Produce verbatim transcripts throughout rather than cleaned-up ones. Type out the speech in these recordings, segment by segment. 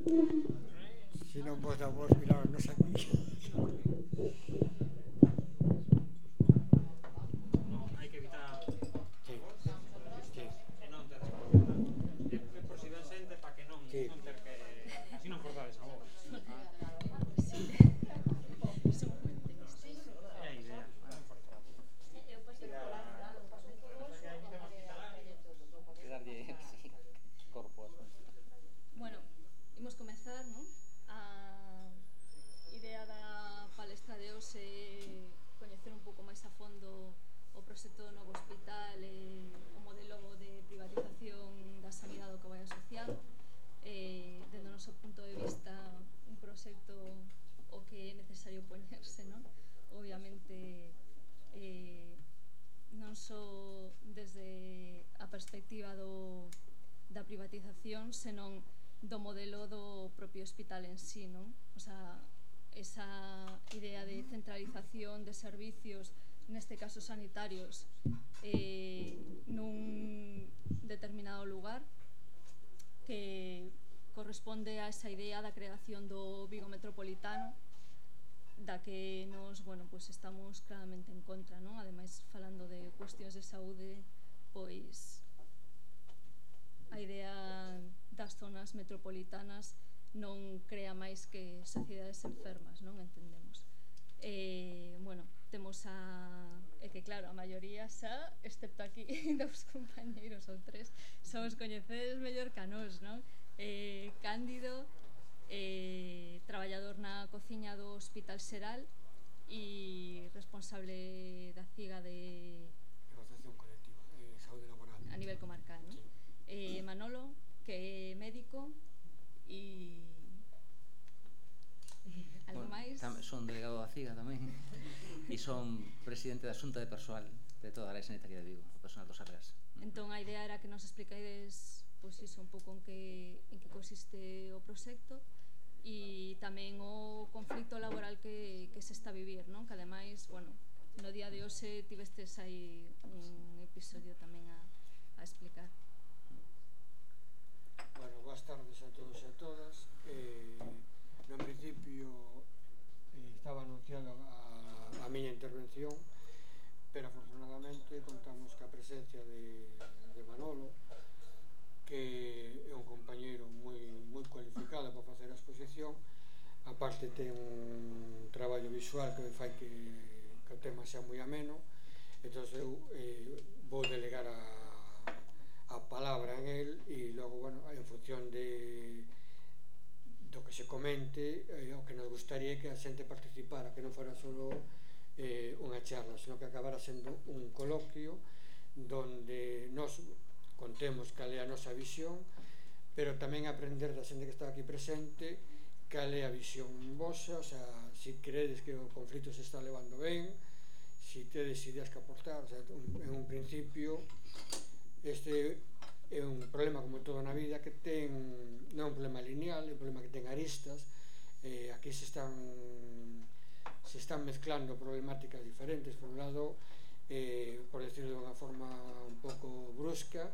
Si non vos da vos mirarnos aquí. Non, hai que evitar Sí, sí, e non ter responsabilidade. É, é por si ben xente para que non, sí. non ter que... Así non forzades a voz. Sí. Somos moi optimistas. É a idea, non forzar a voz. Quedarlle sí, corpo as cousas. Bueno, imos comezar, non? A idea da palestra de hoxe é coñecer un pouco máis a fondo o proxecto do novo hospital e o modelo de privatización da sanidade ao que vai asociado. Eh, dende o noso punto de vista, un proxecto o que é necesario poñerse, non? Obviamente, eh, non só desde a perspectiva do, da privatización, senón do modelo do propio hospital en sí, non? O sea, esa idea de centralización de servicios, neste caso sanitarios, eh, nun determinado lugar, que corresponde a esa idea da creación do Vigo Metropolitano, da que nos, bueno, pues estamos claramente en contra, non? Ademais, falando de cuestións de saúde, pois a idea das zonas metropolitanas non crea máis que sociedades enfermas, non? Entendemos. Eh, bueno, temos a... É que claro, a maioría xa, excepto aquí, dous compañeiros ou tres, somos coñecedes mellor que a nós, non? Eh, Cándido, eh, traballador na cociña do Hospital Xeral e responsable da C I G A de... Negociación colectiva, eh, saúde laboral. A nivel comarcal, non? Sí. Eh, Manolo, que é médico e... Algo Bueno, máis? tam, son delegado da C I G A tamén e son presidente da Xunta de Persoal de toda a área sanitaria de Vigo, o personal dos Arreas. Entón a idea era que nos explicaides pois iso, un pouco en que, en que consiste o proxecto e tamén o conflito laboral que, que se está a vivir, non? Que ademais, bueno, no día de hoxe tivestes aí un episodio tamén a, a explicar. Bueno, boas tardes a todos e a todas. Eh, no principio eh, estaba anunciado a, a miña intervención, pero afortunadamente contamos ca presencia de, de Manolo, que é un compañeiro moi, moi cualificado para facer a exposición. Aparte ten un traballo visual que fai que, que o tema sea moi ameno. Entón eu eh, vou delegar a, a palabra en el e logo, bueno, en función de do que se comente, eh, o que nos gustaría que a xente participara, que non fora só eh, unha charla, senón que acabara sendo un coloquio donde nos contemos cal é a nosa visión, pero tamén aprender da xente que está aquí presente cal é a visión vosa, o sea, si credes que o conflito se está levando ben, si tedes ideas que aportar. O sea, en un principio este é un problema como todo na vida que ten, non é un problema lineal, é un problema que ten aristas. Eh, aquí se están se están mezclando problemáticas diferentes. Por un lado, eh, por decirlo de unha forma un pouco brusca,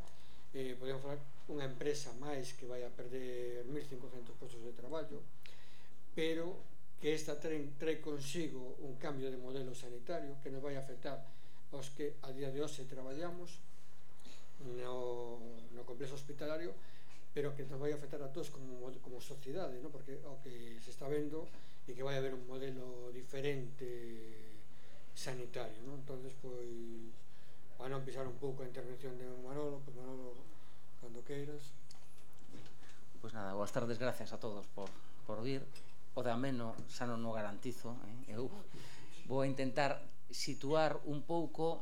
eh, podemos falar unha empresa máis que vai a perder mil cincocentos postos de traballo, pero que esta trae, trae consigo un cambio de modelo sanitario que nos vai a afectar aos que a día de hoxe traballamos no, no complexo hospitalario, pero que nos vai a afectar a todos como, como sociedade, ¿no? Porque o que se está vendo é que vai haber un modelo diferente sanitario, ¿no? Entonces, pois, para non pisar un pouco a intervención de Manolo, pois Manolo, cando queiras. Pois nada, boas tardes, gracias a todos por, por vir. O de ameno xa non o garantizo, eh? Eu vou a intentar situar un pouco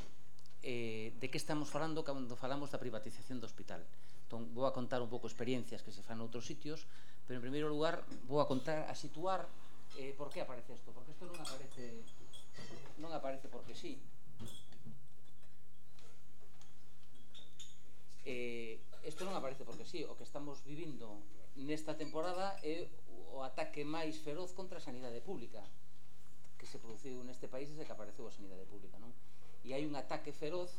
eh, de que estamos falando cando falamos da privatización do hospital. Entón, vou a contar un pouco experiencias que se fan noutros sitios, pero en primeiro lugar vou a contar, a situar eh, por que aparece isto, porque isto non aparece non aparece porque sí. Eh, isto non aparece porque sí. O que estamos vivindo nesta temporada é o ataque máis feroz contra a sanidade pública que se produciu neste país desde que apareceu a sanidade pública, non? E hai un ataque feroz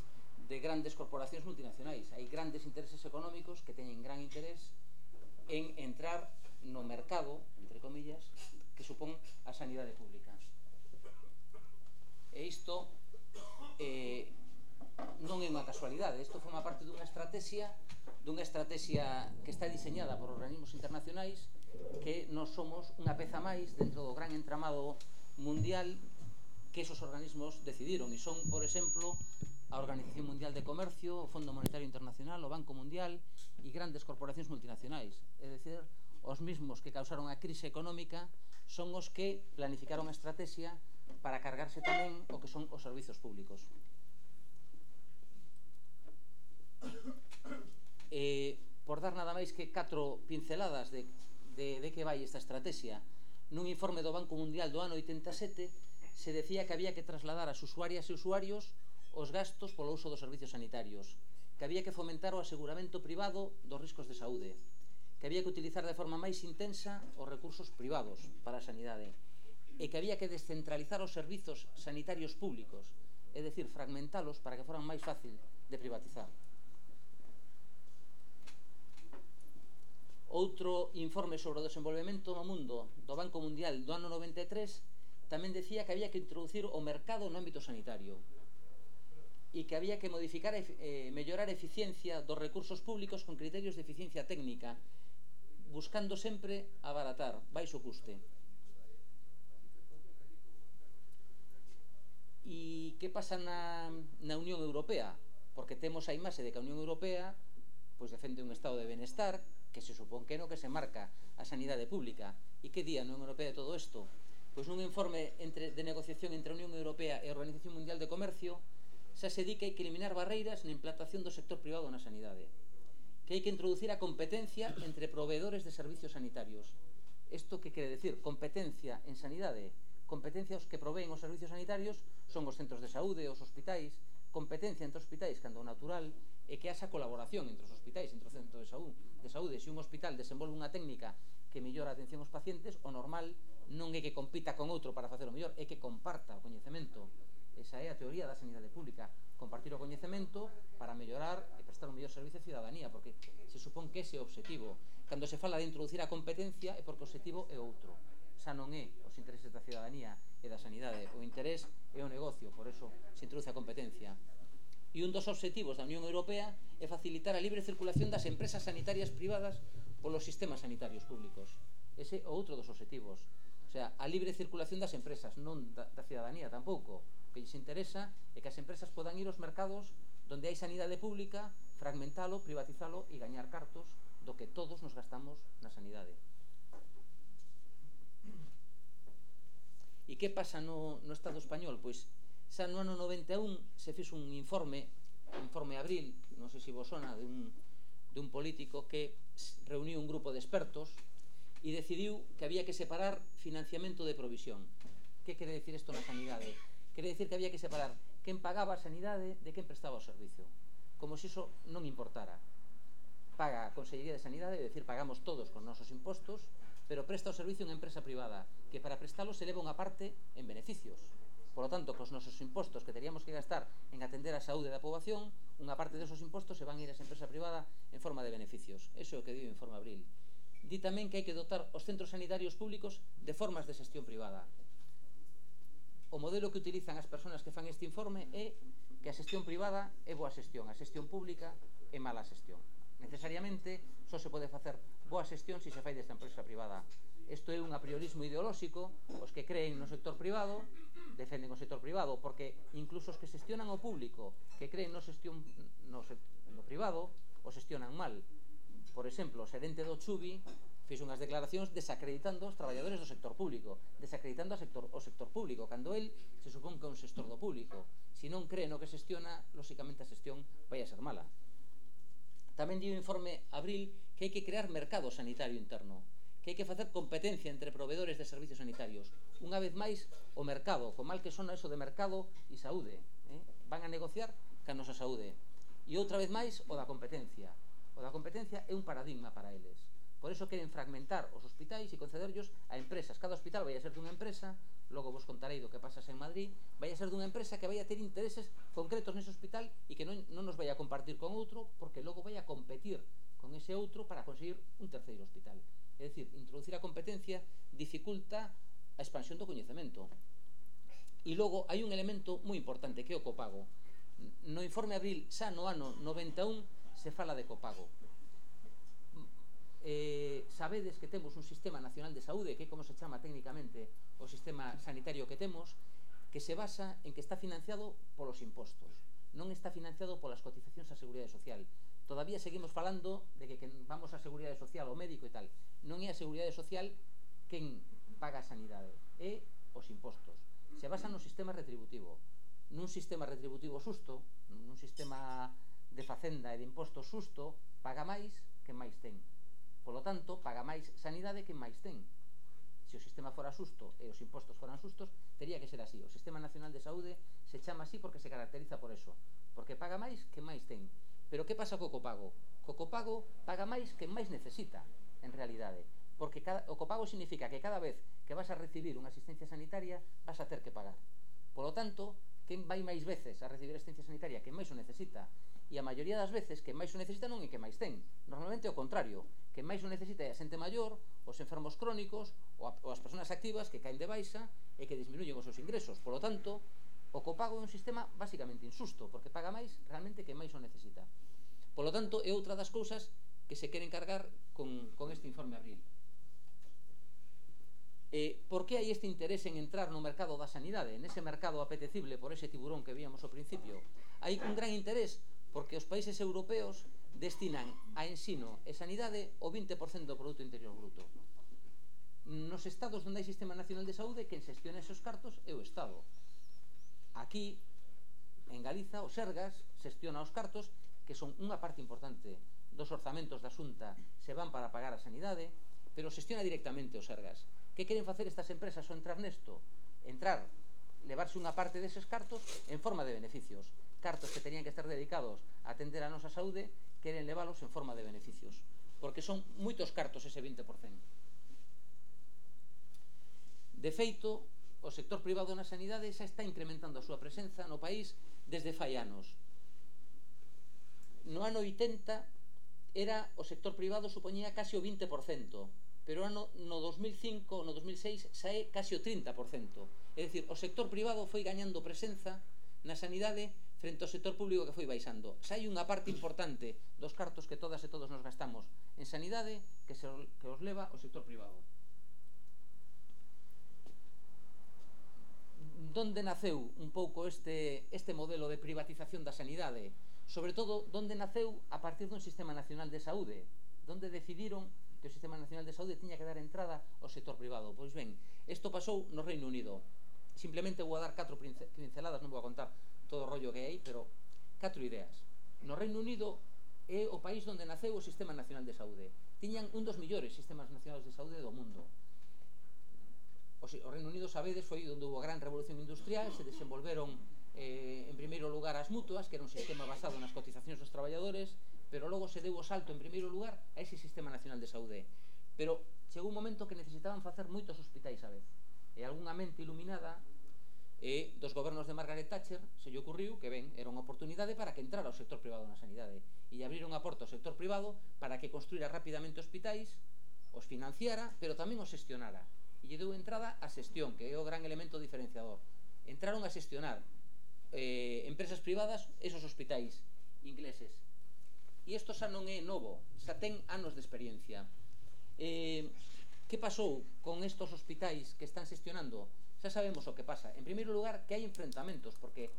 de grandes corporacións multinacionais. Hai grandes intereses económicos que teñen gran interés en entrar no mercado, entre comillas, que supón a sanidade pública. E isto eh, non é unha casualidade, isto forma parte dunha estrategia dunha estrategia que está diseñada por organismos internacionais, que nós somos unha peza máis dentro do gran entramado mundial que esos organismos decidiron, e son, por exemplo, a Organización Mundial de Comercio, o Fondo Monetario Internacional, o Banco Mundial e grandes corporacións multinacionais. É dicir, os mismos que causaron a crise económica son os que planificaron a estrategia para cargarse tamén o que son os servizos públicos. Eh, por dar nada máis que catro pinceladas de, de, de que vai esta estrategia, nun informe do Banco Mundial do ano oitenta e sete se decía que había que trasladar ás usuarias e usuarios os gastos polo uso dos servicios sanitarios, que había que fomentar o aseguramento privado dos riscos de saúde, que había que utilizar de forma máis intensa os recursos privados para a sanidade, e que había que descentralizar os servizos sanitarios públicos, é dicir, fragmentalos para que foran máis fácil de privatizar. Outro informe sobre o desenvolvemento no mundo do Banco Mundial do ano noventa e tres tamén decía que había que introducir o mercado no ámbito sanitario e que había que modificar e eh, mellorar a eficiencia dos recursos públicos con criterios de eficiencia técnica, buscando sempre abaratar, baixo custe. E que pasa na, na Unión Europea? Porque temos a imaxe de que a Unión Europea pois defende un estado de benestar que se supón que no que se marca a sanidade pública. E que di a Unión Europea de todo isto? Pois nun informe entre, de negociación entre a Unión Europea e a Organización Mundial de Comercio xa se di que hai que eliminar barreiras na implantación do sector privado na sanidade, que hai que introducir a competencia entre proveedores de servicios sanitarios. Isto que quere decir? Competencia en sanidade. Competencia os que proveen os servicios sanitarios son os centros de saúde, os hospitais. Competencia entre hospitais cando o natural é que haxa colaboración entre os hospitais, entre os centros de saúde. De saúde. Se un hospital desenvolve unha técnica que mellora a atención aos pacientes, o normal non é que compita con outro para facelo mellor, é que comparta o coñecemento. Esa é a teoría da sanidade pública, compartir o coñecemento para mellorar e prestar un mellor servicio a cidadanía, porque se supón que ese é o objetivo. Cando se fala de introducir a competencia é porque o objetivo é outro, xa non é os intereses da cidadanía e da sanidade, o interés é o negocio, por eso se introduce a competencia. E un dos obxectivos da Unión Europea é facilitar a libre circulación das empresas sanitarias privadas polos sistemas sanitarios públicos. Ese é outro dos obxectivos. O sea, a libre circulación das empresas, non da, da cidadanía tampouco. O que lles interesa é que as empresas podan ir aos mercados donde hai sanidade pública, fragmentalo, privatizalo e gañar cartos do que todos nos gastamos na sanidade. E que pasa no, no Estado español? Pois xa no ano noventa e un se fixo un informe, un informe Abril, non sei se vos sona, de un, de un político que reuniu un grupo de expertos e decidiu que había que separar financiamento de provisión. Que quere decir isto na sanidade? Quere decir que había que separar quen pagaba a sanidade de quen prestaba o servicio, como se iso non importara. Paga a Consellería de Sanidade, é dicir, pagamos todos con nosos impostos, pero presta o servicio unha empresa privada, que para prestalo se leva unha parte en beneficios. Por lo tanto, cos nosos impostos que teríamos que gastar en atender a saúde da poboación, unha parte desos impostos se van a ir a esa empresa privada en forma de beneficios. Eso é o que di o informe Abril. Di tamén que hai que dotar os centros sanitarios públicos de formas de xestión privada. O modelo que utilizan as persoas que fan este informe é que a xestión privada é boa xestión, a xestión pública é mala xestión. Necesariamente só se pode facer boa xestión se se fai desta empresa privada. Isto é un apriorismo ideolóxico. Os que creen no sector privado defenden o sector privado, porque incluso os que xestionan o público, que creen no, xestión, no, no privado, o xestionan mal. Por exemplo, o xerente do Chubi fixo unhas declaracións desacreditando os traballadores do sector público, desacreditando o sector, o sector público, cando el se supón que é un xestor do público. Se non cree no que xestiona, lóxicamente a xestión vai a ser mala. Tamén di o informe Abril que hai que crear mercado sanitario interno, que hai que facer competencia entre proveedores de servicios sanitarios. Unha vez máis, o mercado, con mal que sona eso de mercado e saúde, eh? van a negociar ca nosa saúde. E outra vez máis, o da competencia. O da competencia é un paradigma para eles. Por eso queren fragmentar os hospitais e concederllos a empresas. Cada hospital vai a ser dunha empresa, logo vos contarei do que pasas en Madrid, vai a ser dunha empresa que vai a ter intereses concretos nese hospital e que non, non nos vai a compartir con outro, porque logo vai a competir con ese outro para conseguir un terceiro hospital. É dicir, introducir a competencia dificulta a expansión do coñecemento. E logo hai un elemento moi importante que é o copago. No informe Abril, xa no ano noventa e un, se fala de copago. Eh, sabedes que temos un sistema nacional de saúde, que é como se chama técnicamente o sistema sanitario que temos, que se basa en que está financiado polos impostos, non está financiado polas cotizacións á Seguridade Social. Todavía seguimos falando de que, que vamos á Seguridade Social, ao médico e tal. Non é a Seguridade Social quen paga a sanidade, é os impostos. Se basa no sistema retributivo. Nun sistema retributivo xusto, nun sistema de facenda e de impostos xusto, paga máis que máis ten. Polo tanto, paga máis sanidade que máis ten. Se o sistema fora xusto e os impostos foran xustos, tería que ser así. O Sistema Nacional de Saúde se chama así porque se caracteriza por eso, porque paga máis que máis ten. Pero que pasa co copago? Co copago paga máis que máis necesita, en realidade, porque cada, o copago significa que cada vez que vas a recibir unha asistencia sanitaria vas a ter que pagar. Polo tanto, quen vai máis veces a recibir asistencia sanitaria? Quen máis o necesita. E a maioría das veces quen máis o necesita non é quen máis ten. Normalmente é o contrario. Quen máis o necesita é a xente maior, os enfermos crónicos ou, a, ou as persoas activas que caen de baixa e que disminuyen os seus ingresos. Polo tanto, o copago é un sistema basicamente insusto, porque paga máis realmente quen máis o necesita. Polo tanto, é outra das cousas que se queren cargar con, con este informe Abril. Eh, por que hai este interés en entrar no mercado da sanidade, nese mercado apetecible por ese tiburón que víamos ao principio? Hai un gran interés porque os países europeos destinan a ensino e sanidade o vinte por cento do Produto Interior Bruto. Nos estados onde hai Sistema Nacional de Saúde, quen xestiona esos cartos é o Estado. Aquí, en Galiza, o Sergas xestiona os cartos, que son unha parte importante dos orzamentos da Xunta, se van para pagar a sanidade, pero xestiona directamente o Sergas. Que queren facer estas empresas ao entrar nesto? Entrar, levarse unha parte deses cartos en forma de beneficios. Cartos que tenían que estar dedicados a atender a nosa saúde, queren leválos en forma de beneficios, porque son moitos cartos ese vinte por cento. De feito, o sector privado na sanidade xa está incrementando a súa presenza no país desde fai anos. No ano oitenta era o sector privado supoñía casi o vinte por cento, pero ano, no dos mil cinco, no dos mil seis xa é casi o trinta por cento. É dicir, o sector privado foi gañando presenza na sanidade frente ao sector público que foi baixando. Xa hai unha parte importante dos cartos que todas e todos nos gastamos en sanidade que, se, que os leva o sector privado. Donde naceu un pouco este, este modelo de privatización da sanidade? Sobre todo, donde naceu a partir dun Sistema Nacional de Saúde, donde decidiron que o Sistema Nacional de Saúde tiña que dar entrada ao sector privado. Pois ben, isto pasou no Reino Unido. Simplemente vou a dar catro pinceladas, non vou a contar todo o rollo que hai, pero catro ideas. No Reino Unido é o país onde naceu o Sistema Nacional de Saúde. Tiñan un dos millores sistemas nacionales de saúde do mundo. O Reino Unido, sabedes, foi onde houve a gran revolución industrial, se desenvolveron eh, en primeiro lugar as mutuas, que era un sistema basado nas cotizacións dos traballadores, pero logo se deu o salto en primeiro lugar a ese Sistema Nacional de Saúde. Pero chegou un momento que necesitaban facer moitos hospitais a vez. E algunha mente iluminada e dos gobernos de Margaret Thatcher se lle ocurriu que ben, era unha oportunidade para que entrara o sector privado na sanidade e abriron a porta ao sector privado para que construíra rapidamente hospitais, os financiara, pero tamén os xestionara e lle deu entrada a xestión, que é o gran elemento diferenciador. Entraron a xestionar eh, empresas privadas esos hospitais ingleses e isto xa non é novo, xa ten anos de experiencia. Eh, que pasou con estos hospitais que están xestionando? Xa sabemos o que pasa. En primeiro lugar, que hai enfrentamentos, porque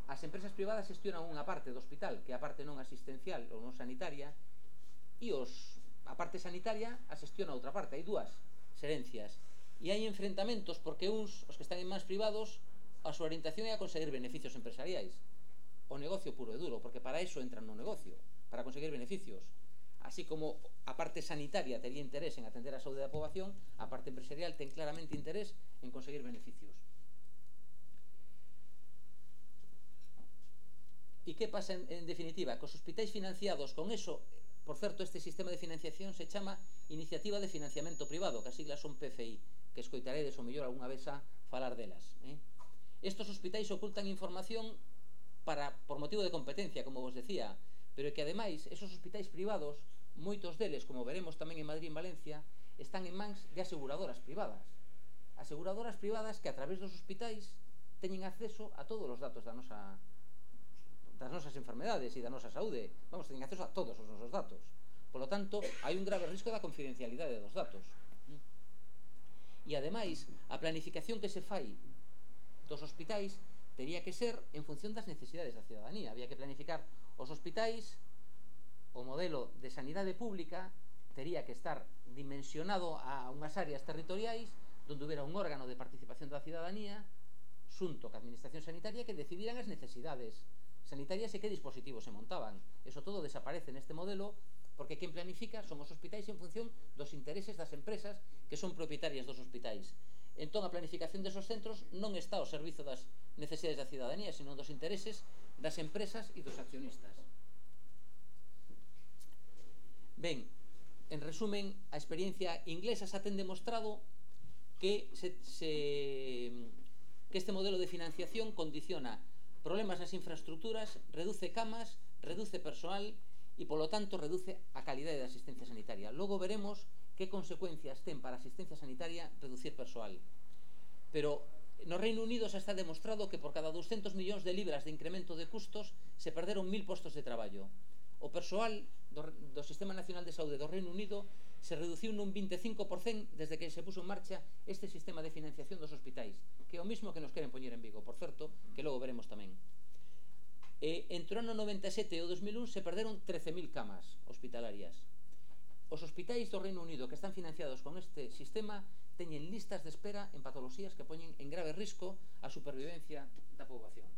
as empresas privadas xestionan unha parte do hospital, que é a parte non asistencial ou non sanitaria, e os, a parte sanitaria a xestiona outra parte. Hai dúas xerencias. E hai enfrentamentos porque uns, os que están en mans privados, a súa orientación é a conseguir beneficios empresariais. O negocio puro e duro, porque para iso entran no negocio, para conseguir beneficios. Así como a parte sanitaria tería interés en atender a saúde da poboación, a parte empresarial ten claramente interés en conseguir beneficios. E que pasa en, en definitiva? Que os hospitais financiados con eso, por certo, este sistema de financiación se chama Iniciativa de Financiamento Privado, que as siglas son P F I, que escoitaredes o mellor algunha vez a falar delas. Eh? Estos hospitais ocultan información para, por motivo de competencia, como vos decía, pero que ademais esos hospitais privados, moitos deles, como veremos tamén en Madrid e en Valencia, están en mans de aseguradoras privadas. Aseguradoras privadas que a través dos hospitais teñen acceso a todos os datos da nosa, das nosas enfermedades e da nosa saúde. Vamos, teñen acceso a todos os nosos datos. Por lo tanto, hai un grave risco da confidencialidade dos datos. E, ademais, a planificación que se fai dos hospitais tería que ser en función das necesidades da ciudadanía. Había que planificar os hospitais, o modelo de sanidade pública tería que estar dimensionado a unhas áreas territoriais donde houbera un órgano de participación da ciudadanía xunto ca administración sanitaria que decidiran as necesidades sanitarias e que dispositivos se montaban. Eso todo desaparece neste modelo porque quen planifica son os hospitais en función dos intereses das empresas que son propietarias dos hospitais. Entón, a planificación desos centros non está ao servizo das necesidades da ciudadanía, sino dos intereses das empresas e dos accionistas. Ben, en resumen, a experiencia inglesa xa ten demostrado que, se, se, que este modelo de financiación condiciona problemas nas infraestructuras, reduce camas, reduce persoal e, polo tanto, reduce a calidade da asistencia sanitaria. Logo veremos que consecuencias ten para a asistencia sanitaria reducir persoal. Pero no Reino Unido xa está demostrado que por cada douscentos millóns de libras de incremento de custos se perderon mil postos de traballo. O persoal do, do Sistema Nacional de Saúde do Reino Unido se reduciu nun vinte e cinco por cento desde que se puso en marcha este sistema de financiación dos hospitais, que é o mismo que nos queren poñer en Vigo, por certo, que logo veremos tamén. E entre o ano noventa e sete e o dos mil un se perderon trece mil camas hospitalarias. Os hospitais do Reino Unido que están financiados con este sistema teñen listas de espera en patoloxías que poñen en grave risco a supervivencia da poboación.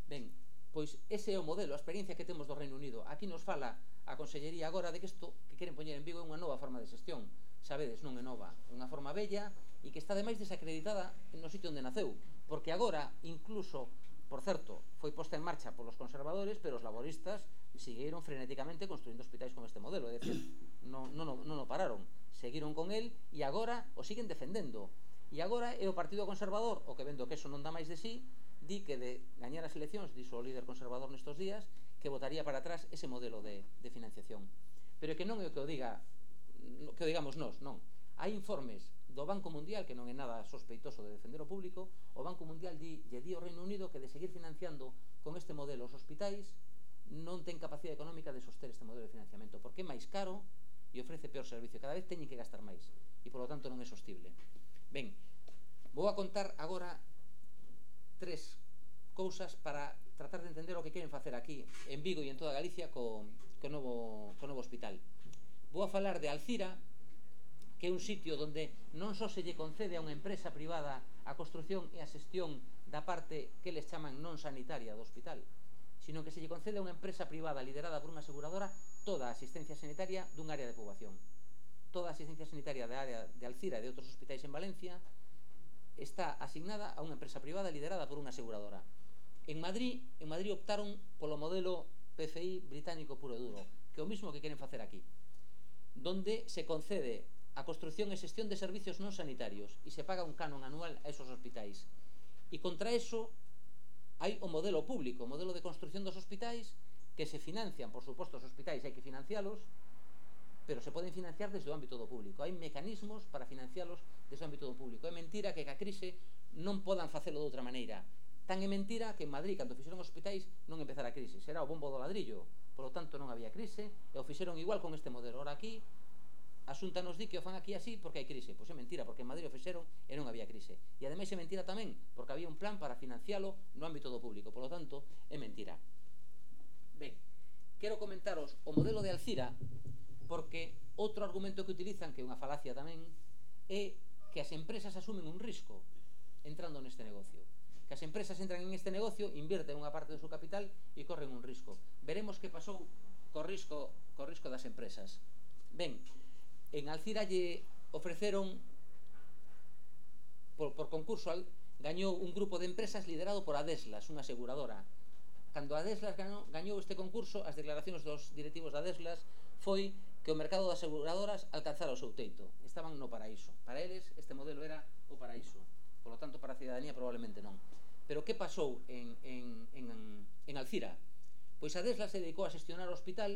Ben, pois ese é o modelo, a experiencia que temos do Reino Unido. Aquí nos fala a Consellería agora de que isto que queren poñer en Vigo é unha nova forma de xestión. Sabedes, non é nova, unha forma bella e que está ademais desacreditada no sitio onde naceu, porque agora, incluso, por certo, foi posta en marcha polos conservadores, pero os laboristas seguiron frenéticamente construindo hospitais con este modelo, é dicir, non, non, non o pararon, seguiron con el e agora o siguen defendendo. E agora é o Partido Conservador, o que vendo que eso non dá máis de sí, di que de gañar as eleccións, dixo o líder conservador nestos días, que votaría para atrás ese modelo de, de financiación. Pero que non é o que o diga, que o digamos nós, non. Hai informes do Banco Mundial, que non é nada sospeitoso de defender o público, o Banco Mundial di, lle di ao Reino Unido que de seguir financiando con este modelo os hospitais non ten capacidade económica de soster este modelo de financiamento, porque é máis caro e ofrece peor servicio, cada vez teñen que gastar máis e polo tanto non é sostible. Ben, vou a contar agora tres cousas para tratar de entender o que queren facer aquí en Vigo e en toda Galicia co, co, novo, co novo hospital. Vou a falar de Alcira, que é un sitio onde non só se lle concede a unha empresa privada a construción e a xestión da parte que les chaman non sanitaria do hospital, sino que se lle concede a unha empresa privada liderada por unha aseguradora toda a asistencia sanitaria dun área de poboación. Toda a asistencia sanitaria da área de Alcira e de outros hospitais en Valencia está asignada a unha empresa privada liderada por unha aseguradora. En Madrid, en Madrid optaron polo modelo P F I británico puro e duro, que é o mismo que queren facer aquí, donde se concede a construción e xestión de servicios non sanitarios e se paga un canon anual a esos hospitais. E contra eso hai o modelo público, o modelo de construción dos hospitais que se financian, por suposto, os hospitais hai que financialos, pero se poden financiar desde o ámbito do público. Hai mecanismos para financialos desde o ámbito do público. É mentira que ca crise non podan facelo de outra maneira. Tan é mentira que en Madrid, cando fixeron os hospitais, non empezara a crise. Será o bombo do ladrillo. Por lo tanto, non había crise e o fixeron igual con este modelo. Ora aquí, a Xunta nos di que o fan aquí así porque hai crise. Pois é mentira, porque en Madrid o fixeron e non había crise. E ademais é mentira tamén, porque había un plan para financialo no ámbito do público. Por lo tanto, é mentira. Ben, quero comentaros o modelo de Alcira, porque outro argumento que utilizan, que é unha falacia tamén, é que as empresas asumen un risco entrando neste negocio. Que as empresas entran en este negocio, invierten unha parte do seu capital e corren un risco. Veremos que pasou co risco, co risco das empresas. Ben, en Alcira lle ofreceron por, por concurso, gañou un grupo de empresas liderado por Adeslas, unha aseguradora. Cando Adeslas gañou, gañou este concurso, as declaracións dos directivos de Adeslas foi que o mercado de aseguradoras alcanzara o seu teito. Estaban no paraíso. Para eles, este modelo era o paraíso. Por lo tanto, para a cidadanía probablemente non. Pero que pasou en, en, en, en Alcira? Pois Adeslas se dedicou a xestionar o hospital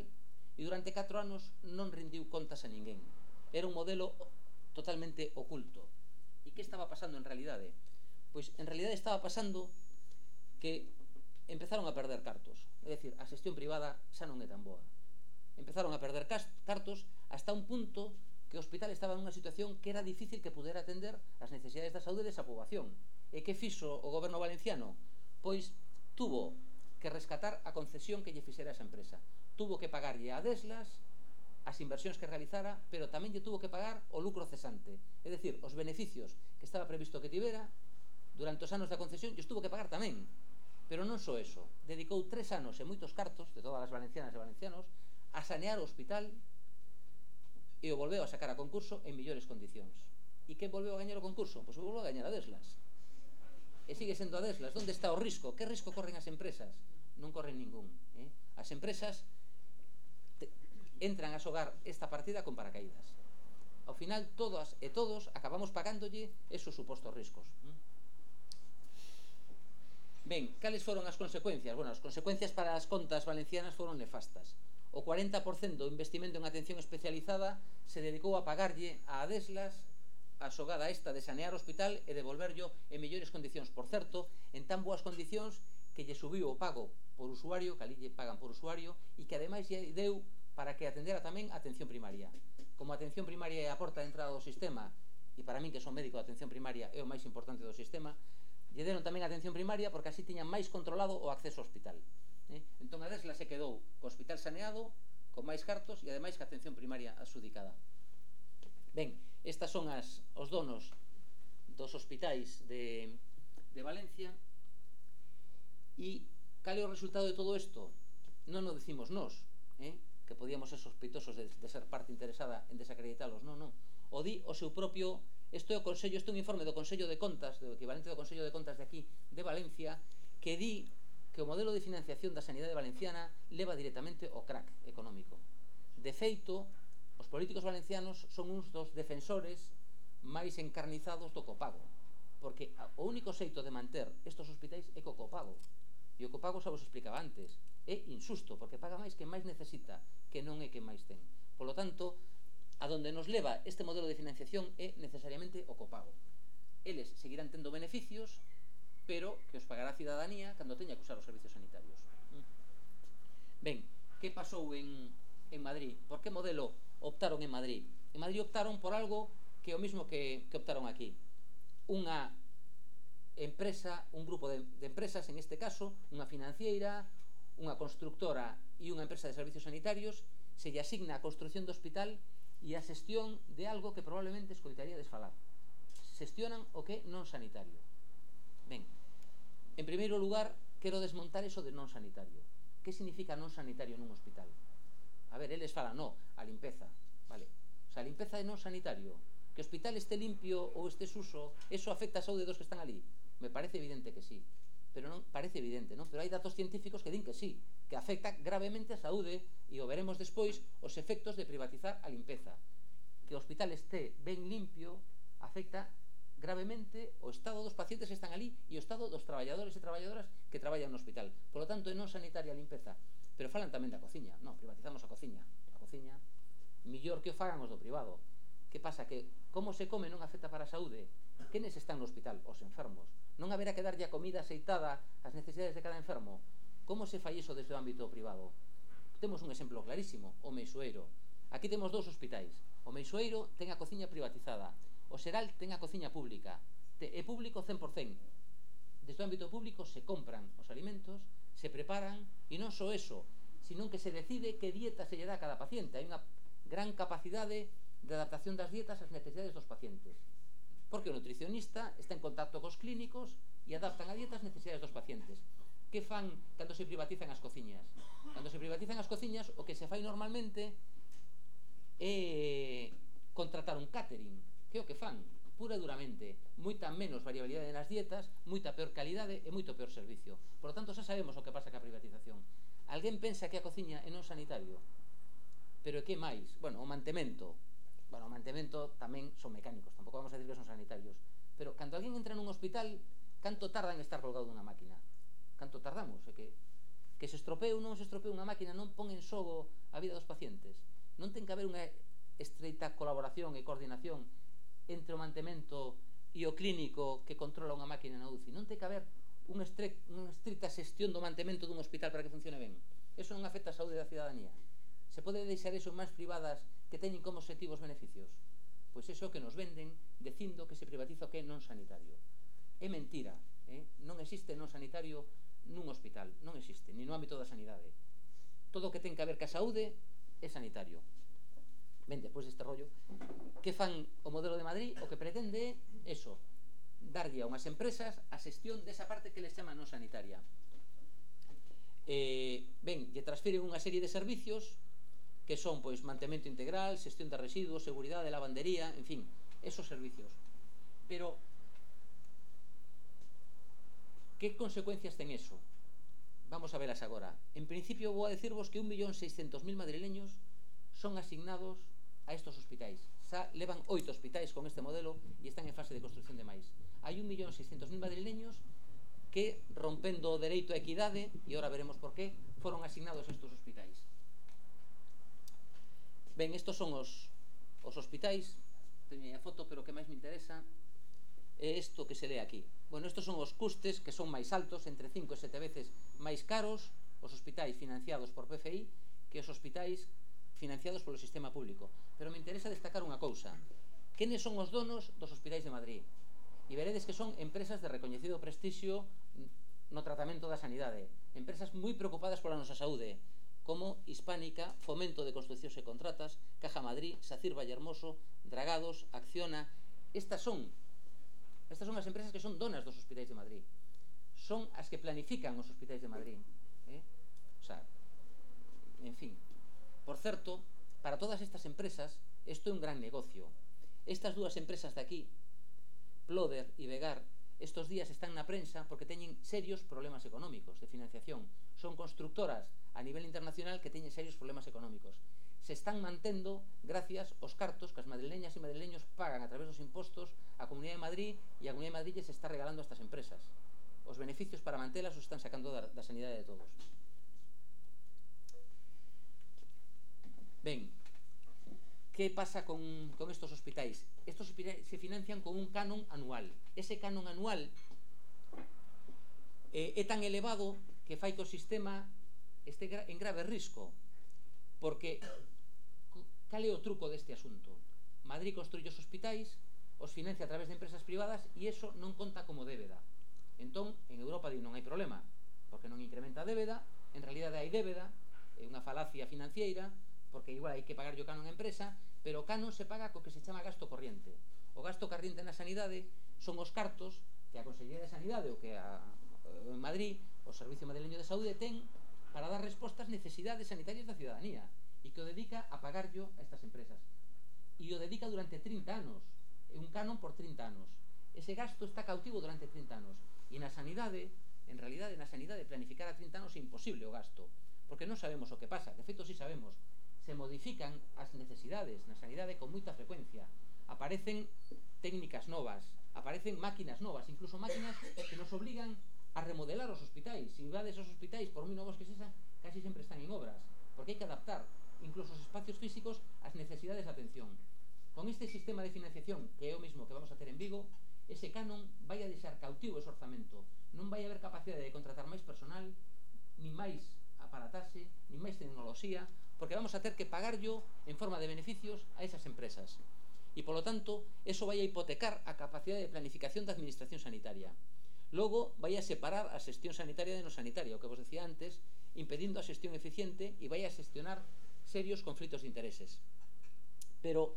e durante catro anos non rendiu contas a ninguén. era un modelo totalmente oculto. E que estaba pasando en realidade? Pois en realidade estaba pasando que empezaron a perder cartos. É dicir, a xestión privada xa non é tan boa. Empezaron a perder cartos hasta un punto que o hospital estaba nunha situación que era difícil que pudera atender as necesidades da saúde desa poboación. E que fixo o goberno valenciano? Pois tuvo que rescatar a concesión que lle fixera esa empresa. Tuvo que pagarlle a Deslas as inversións que realizara, pero tamén lle tuvo que pagar o lucro cesante. É dicir, os beneficios que estaba previsto que tivera durante os anos da concesión lles tuvo que pagar tamén. Pero non só eso, dedicou tres anos e moitos cartos de todas as valencianas e valencianos a sanear o hospital e o volveu a sacar a concurso en millores condicións. E que volveu a gañar o concurso? Pois o volveu a gañar a Deslas. E sigue sendo a Deslas. Onde está o risco? Que risco corren as empresas? Non corren ningún. Eh? As empresas te, entran a xogar esta partida con paracaídas. Ao final, todas e todos acabamos pagándolle esos supostos riscos. Ben, cales foron as consecuencias? Bueno, as consecuencias para as contas valencianas foron nefastas. O cuarenta por cento do investimento en atención especializada se dedicou a pagarlle a Deslas a xogada esta de sanear o hospital e devolverlo en mellores condicións. Por certo, en tan boas condicións que lle subiu o pago por usuario, que ali lle pagan por usuario, e que ademais lle deu para que atendera tamén a atención primaria. Como a atención primaria é a porta de entrada do sistema, e para min que son médico de atención primaria é o máis importante do sistema, lle deron tamén a atención primaria porque así tiñan máis controlado o acceso ao hospital. Eh? Entón a Desla se quedou co hospital saneado, con máis cartos e ademais que a atención primaria adxudicada. Ben, estas son as, os donos dos hospitais de, de Valencia. E cal é o resultado de todo isto? Non o decimos nós, eh? que podíamos ser sospeitosos de, de ser parte interesada en desacreditalos. Non, non. O di o seu propio... Isto é o Consello, isto é un informe do Consello de Contas, do equivalente do Consello de Contas de aquí, de Valencia, que di que o modelo de financiación da sanidade valenciana leva directamente ao crack económico. De feito, os políticos valencianos son uns dos defensores máis encarnizados do copago, porque o único xeito de manter estes hospitais é co copago. E o copago, xa vos explicaba antes, é insusto, porque paga máis que máis necesita, que non é que máis ten. Por lo tanto, a donde nos leva este modelo de financiación é necesariamente o copago. Eles seguirán tendo beneficios, pero que os pagará a cidadanía cando teña que usar os servicios sanitarios. Ben, que pasou en, en Madrid? Por que modelo optaron en Madrid? En Madrid optaron por algo que é o mismo que, que optaron aquí. Unha empresa, un grupo de, de empresas, en este caso, unha financiera, unha constructora e unha empresa de servicios sanitarios, se lle asigna a construcción do hospital e a xestión de algo que probablemente escoitaríades falar. Xestionan o que é non sanitario. Ben, en primeiro lugar, quero desmontar eso de non sanitario. Que significa non sanitario nun hospital? A ver, eles falan, no, a limpeza, vale. O sea, a limpeza é non sanitario. Que o hospital este limpio ou este suso, eso afecta a saúde dos que están ali? Me parece evidente que sí. Pero non parece evidente, non? Pero hai datos científicos que din que sí, que afecta gravemente a saúde, e o veremos despois, os efectos de privatizar a limpeza. Que o hospital este ben limpio afecta gravemente o estado dos pacientes que están ali e o estado dos traballadores e traballadoras que traballan no hospital. Por lo tanto, é non sanitaria a limpeza. Pero falan tamén da cociña. Non, privatizamos a cociña. A cociña, millor que o fagan os do privado. Que pasa? Que como se come non afecta para a saúde? Quenes están no hospital? Os enfermos. Non haberá que darlle a comida aceitada ás necesidades de cada enfermo? Como se fai iso desde o ámbito privado? Temos un exemplo clarísimo, o Meixoeiro. Aquí temos dous hospitais. O Meixoeiro ten a cociña privatizada. O Xeral ten a cociña pública. É público cen por cento. Desde o ámbito público se compran os alimentos, se preparan, e non só eso, sino que se decide que dieta se lle dá a cada paciente. Hai unha gran capacidade de adaptación das dietas ás necesidades dos pacientes. Porque o nutricionista está en contacto cos clínicos e adaptan a dieta ás necesidades dos pacientes. Que fan cando se privatizan as cociñas? Cando se privatizan as cociñas, o que se fai normalmente é contratar un catering. Que é o que fan? Pura e duramente. Moita menos variabilidade nas dietas, moita peor calidade e moito peor servicio. Por lo tanto, xa sabemos o que pasa ca privatización. Alguén pensa que a cociña é non sanitario? Pero que máis? Bueno, o mantemento. Bueno, o mantemento tamén son mecánicos, tampouco vamos a decir que son sanitarios. Pero cando alguén entra nun hospital, canto tarda en estar colgado dunha máquina? Canto tardamos? É que, que se estropee ou non se estropee unha máquina non pon en xogo a vida dos pacientes. Non ten que haber unha estreita colaboración e coordinación entre o mantemento e o clínico que controla unha máquina na U C I. Non ten que haber unha estricta xestión do mantemento dun hospital para que funcione ben. Eso non afecta a saúde da cidadanía. Se pode deixar eso en mans privadas que teñen como obxectivos beneficios? Pois iso que nos venden dicindo que se privatiza o que é non sanitario. É mentira, eh? Non existe non sanitario nun hospital, non existe, ni no ámbito da sanidade. Todo o que ten que ver ca saúde é sanitario. Ben, depois deste rollo, que fan o modelo de Madrid? O que pretende é eso, darlle a unhas empresas a xestión desa parte que les chama non sanitaria. Eh, ben, lle transfiren unha serie de servicios que son, pois, mantemento integral, xestión de residuos, seguridade, lavandería, en fin, esos servicios. Pero, que consecuencias ten eso? Vamos a velas agora. En principio, vou a decirvos que un millón seiscentos mil madrileños son asignados a estos hospitais. Xa levan oito hospitais con este modelo e están en fase de construcción de máis. Hai un millón seiscentos mil madrileños que, rompendo o dereito a equidade, e agora veremos por qué, foron asignados a estos hospitais. Ben, estos son os, os hospitais. Teño a foto, pero o que máis me interesa é isto que se lee aquí. Bueno, estos son os custes que son máis altos, entre cinco e sete veces máis caros os hospitais financiados por P F I que os hospitais financiados polo sistema público. Pero me interesa destacar unha cousa. Quenes son os donos dos hospitais de Madrid? E veredes que son empresas de recoñecido prestixio no tratamento da sanidade. Empresas moi preocupadas pola nosa saúde, como Hispánica, Fomento de Construccións e Contratas, Caja Madrid, Sacir Vallehermoso, Dragados, Acciona. Estas son estas son as empresas que son donas dos hospitais de Madrid. Son as que planifican os hospitais de Madrid. Eh? O sea, en fin. Por certo, para todas estas empresas, isto é un gran negocio. Estas dúas empresas de aquí, Ploder e Vegar, estos días están na prensa porque teñen serios problemas económicos de financiación. Son constructoras a nivel internacional que teñen serios problemas económicos. Se están mantendo gracias aos cartos que as madrileñas e madrileños pagan a través dos impostos a Comunidade de Madrid, e a Comunidade de Madrid se está regalando a estas empresas. Os beneficios para mantelas os están sacando da, da sanidade de todos. Ben, que pasa con, con estos hospitais? Estos hospitais se financian con un canon anual. Ese canon anual eh, é tan elevado que fai que o sistema este en grave risco, porque cal é o truco deste asunto? Madrid construye os hospitais, os financia a través de empresas privadas e iso non conta como débeda. Entón, en Europa non hai problema, porque non incrementa a débeda, en realidade hai débeda, é unha falacia financiera, porque igual hai que pagar o canon a empresa, pero o canon se paga co que se chama gasto corriente. O gasto corriente na sanidade son os cartos que a Consellería de Sanidade ou que a, en Madrid o Servicio Madrileño de Saúde ten para dar resposta ás necesidades sanitarias da cidadanía e que o dedica a pagarlo a estas empresas. E o dedica durante trinta anos. É un canon por trinta anos. Ese gasto está cautivo durante trinta anos. E na sanidade, en realidade, na sanidade planificar a trinta anos é imposible o gasto, porque non sabemos o que pasa. De feito, si sabemos. Se modifican as necesidades na sanidade con moita frecuencia. Aparecen técnicas novas, aparecen máquinas novas, incluso máquinas que nos obligan a remodelar os hospitais. Se vades aos hospitais, por moi novos que sexan, casi sempre están en obras, porque hai que adaptar incluso os espacios físicos ás necesidades de atención. Con este sistema de financiación, que é o mismo que vamos a ter en Vigo, ese canon vai a deixar cautivo ese orzamento. Non vai haber capacidade de contratar máis personal, ni máis aparatase, ni máis tecnoloxía, porque vamos a ter que pagarlo en forma de beneficios a esas empresas. E, polo tanto, eso vai a hipotecar a capacidade de planificación da administración sanitaria. Logo, vai a separar a xestión sanitaria de non sanitaria, o que vos decía antes, impedindo a xestión eficiente e vai a xestionar serios conflitos de intereses. Pero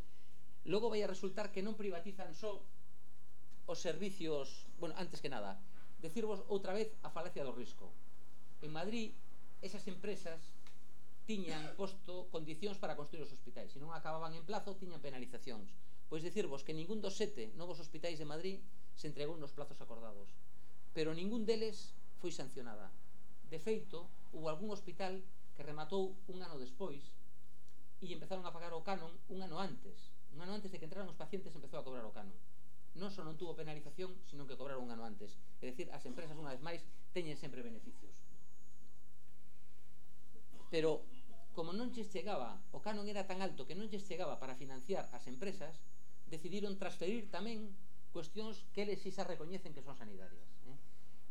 logo vai a resultar que non privatizan só os servicios. Bueno, antes que nada, decirvos outra vez a falacia do risco. En Madrid, esas empresas tiñan posto condicións para construir os hospitais. Se non acababan en plazo, tiñan penalizacións. Pois dicirvos que ningún dos sete novos hospitais de Madrid se entregou nos plazos acordados, pero ningún deles foi sancionada. De feito, hubo algún hospital que rematou un ano despois e empezaron a pagar o canon un ano antes. Un ano antes de que entraran os pacientes empezou a cobrar o canon. Non só non tuvo penalización, sino que cobraron un ano antes. É dicir, as empresas, unha vez máis, teñen sempre beneficios. Pero, como non lles chegaba, o canon era tan alto que non lles chegaba para financiar as empresas, decidiron transferir tamén cuestións que eles si xa recoñecen que son sanitarias. Eh?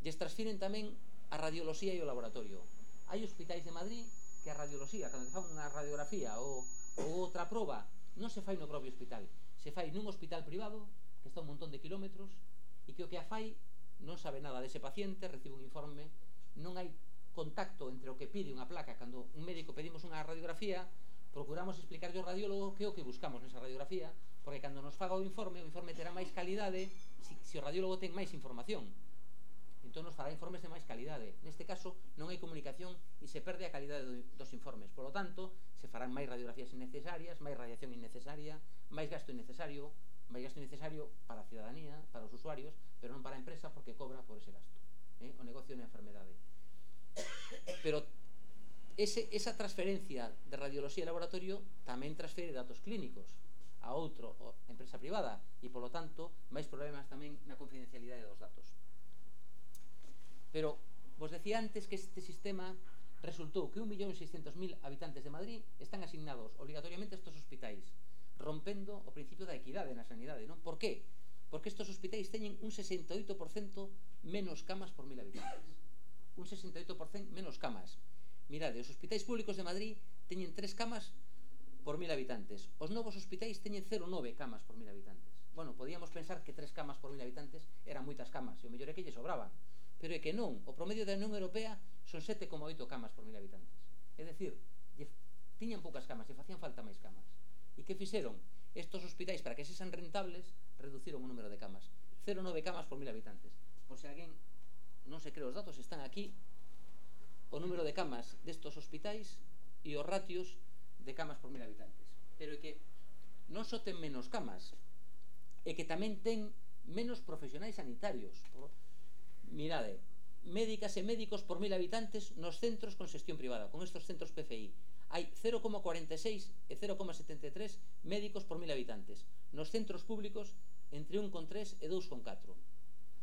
Lles transfiren tamén a radioloxía e o laboratorio. Hai hospitais de Madrid que a radioloxía, cando te fan unha radiografía ou, ou outra proba, non se fai no propio hospital, se fai nun hospital privado que está un montón de kilómetros e que o que a fai non sabe nada dese paciente, recibe un informe, non hai contacto entre o que pide unha placa. Cando un médico pedimos unha radiografía, procuramos explicarlle ao radiólogo que é o que buscamos nesa radiografía, porque cando nos faga o informe, o informe terá máis calidade se, se o radiólogo ten máis información. Entón nos fará informes de máis calidade. Neste caso non hai comunicación e se perde a calidade do, dos informes. Por lo tanto, se farán máis radiografías innecesarias, máis radiación innecesaria, máis gasto innecesario, máis gasto innecesario para a ciudadanía, para os usuarios, pero non para a empresa porque cobra por ese gasto. Eh? O negocio na enfermedade. Pero ese, esa transferencia de radioloxía e laboratorio tamén transfere datos clínicos a outra empresa privada e, polo tanto, máis problemas tamén na confidencialidade dos datos. Pero vos decía antes que este sistema resultou que un millón seiscentos mil habitantes de Madrid están asignados obligatoriamente a estes hospitais, rompendo o principio da equidade na sanidade, non? Por qué? Porque estes hospitais teñen un sesenta e oito por cento menos camas por mil habitantes. Un sesenta e oito por cento menos camas. Mirade, os hospitais públicos de Madrid teñen tres camas por mil habitantes. Os novos hospitais teñen cero coma nove camas por mil habitantes. Bueno, podíamos pensar que tres camas por mil habitantes eran moitas camas, e o mellor é que lle sobraban. Pero é que non, o promedio da Unión Europea son sete coma oito camas por mil habitantes. É dicir, tiñan poucas camas e facían falta máis camas. E que fixeron? Estos hospitais, para que sexan rentables, reduciron o número de camas. cero coma nove camas por mil habitantes. Por se alguén non se cree os datos, están aquí o número de camas destos hospitais e os ratios de camas por mil habitantes. Pero é que non só ten menos camas, é que tamén ten menos profesionais sanitarios. Por, mirade, médicas e médicos por mil habitantes nos centros con xestión privada, con estos centros P F I. Hai cero coma cuarenta e seis e cero coma setenta e tres médicos por mil habitantes. Nos centros públicos, entre un coma tres e dous coma catro.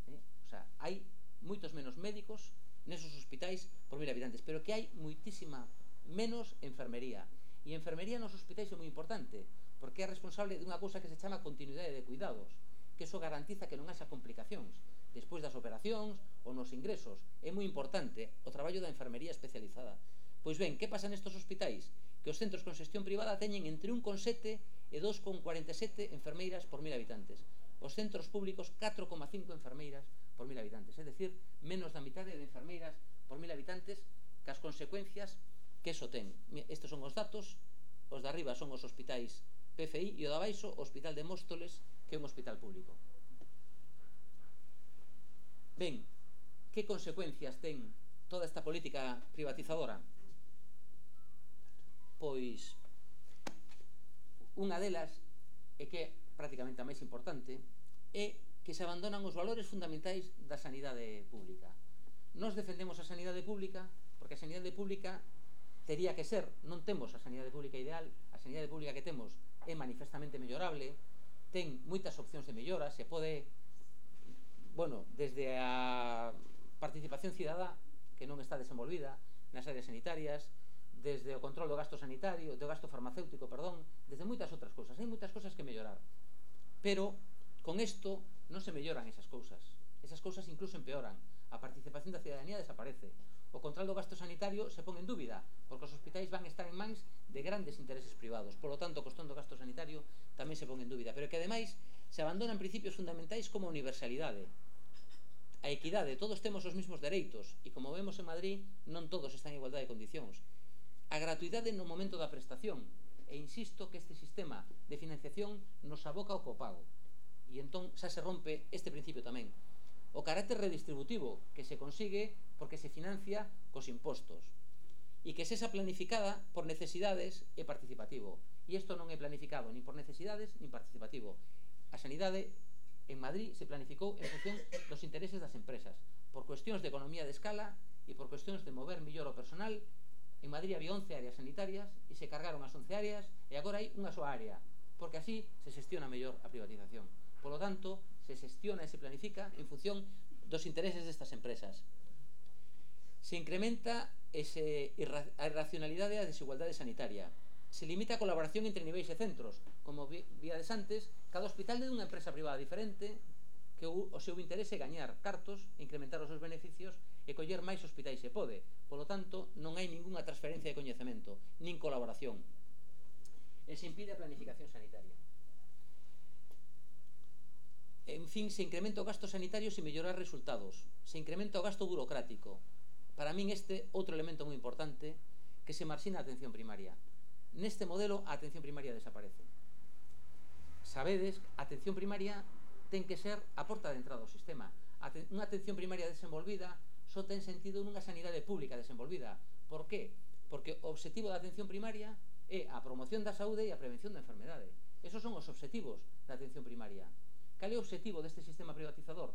Eh? O sea, hai moitos menos médicos nesos hospitais por mil habitantes, pero que hai moitísima menos enfermería. E a enfermería nos hospitais é moi importante, porque é responsable dunha cousa que se chama continuidade de cuidados, que eso garantiza que non haxa complicacións despois das operacións ou nos ingresos. É moi importante o traballo da enfermería especializada. Pois ben, que pasa nestos hospitais? Que os centros con xestión privada teñen entre un coma sete e dos coma cuarenta e sete enfermeiras por mil habitantes. Os centros públicos, catro coma cinco enfermeiras por mil habitantes. É dicir, menos da mitade de enfermeiras por mil habitantes, que as consecuencias que eso ten. Estes son os datos, os de arriba son os hospitais P F I e o de abaixo o Hospital de Móstoles, que é un hospital público. Ben, que consecuencias ten toda esta política privatizadora? Pois unha delas, e que é prácticamente a máis importante, é que se abandonan os valores fundamentais da sanidade pública. Nós defendemos a sanidade pública porque a sanidade pública tería que ser, non temos a sanidade pública ideal, a sanidade pública que temos é manifestamente mellorable, ten moitas opcións de mellora, se pode, bueno, desde a participación cidadá, que non está desenvolvida nas áreas sanitarias, desde o control do gasto sanitario, do gasto farmacéutico, perdón, desde moitas outras cousas. Hai moitas cousas que mellorar. Pero, con isto, non se melloran esas cousas. Esas cousas incluso empeoran. A participación da cidadanía desaparece. O control do gasto sanitario se pon en dúbida, porque os hospitais van estar en mans de grandes intereses privados. Por lo tanto, o costón do gasto sanitario tamén se pon en dúbida. Pero que, ademais, se abandonan principios fundamentais como a universalidade, a equidade. Todos temos os mesmos dereitos e, como vemos en Madrid, non todos están en igualdade de condicións. A gratuidade no momento da prestación, e insisto que este sistema de financiación nos aboca ao copago, e entón xa se rompe este principio tamén. O carácter redistributivo, que se consigue porque se financia cos impostos, e que sexa planificada por necesidades e participativo, e isto non é planificado nin por necesidades nin participativo. A sanidade en Madrid se planificou en función dos intereses das empresas, por cuestións de economía de escala e por cuestións de mover millor o personal. En Madrid había once áreas sanitarias e se cargaron as once áreas e agora hai unha soa área, porque así se xestiona mellor a privatización. Por lo tanto, se xestiona e se planifica en función dos intereses destas empresas. Se incrementa ese, a irracionalidade e a desigualdade sanitaria. Se limita a colaboración entre niveis e centros. Como víades antes, cada hospital é dunha empresa privada diferente que o, o seu interese é gañar cartos, incrementar os seus beneficios e coller máis hospitais se pode. Polo tanto, non hai ningunha transferencia de coñecemento, nin colaboración. E se impide a planificación sanitaria. En fin, se incrementa o gasto sanitario sin mellorar resultados. Se incrementa o gasto burocrático. Para min este outro elemento moi importante, que se marxina a atención primaria. Neste modelo a atención primaria desaparece. Sabedes, a atención primaria ten que ser a porta de entrada ao sistema. Unha atención primaria desenvolvida só ten sentido nunha sanidade pública desenvolvida. Por qué? Porque o obxectivo da atención primaria é a promoción da saúde e a prevención da enfermedade. Esos son os obxectivos da atención primaria. Cal é o obxectivo deste sistema privatizador?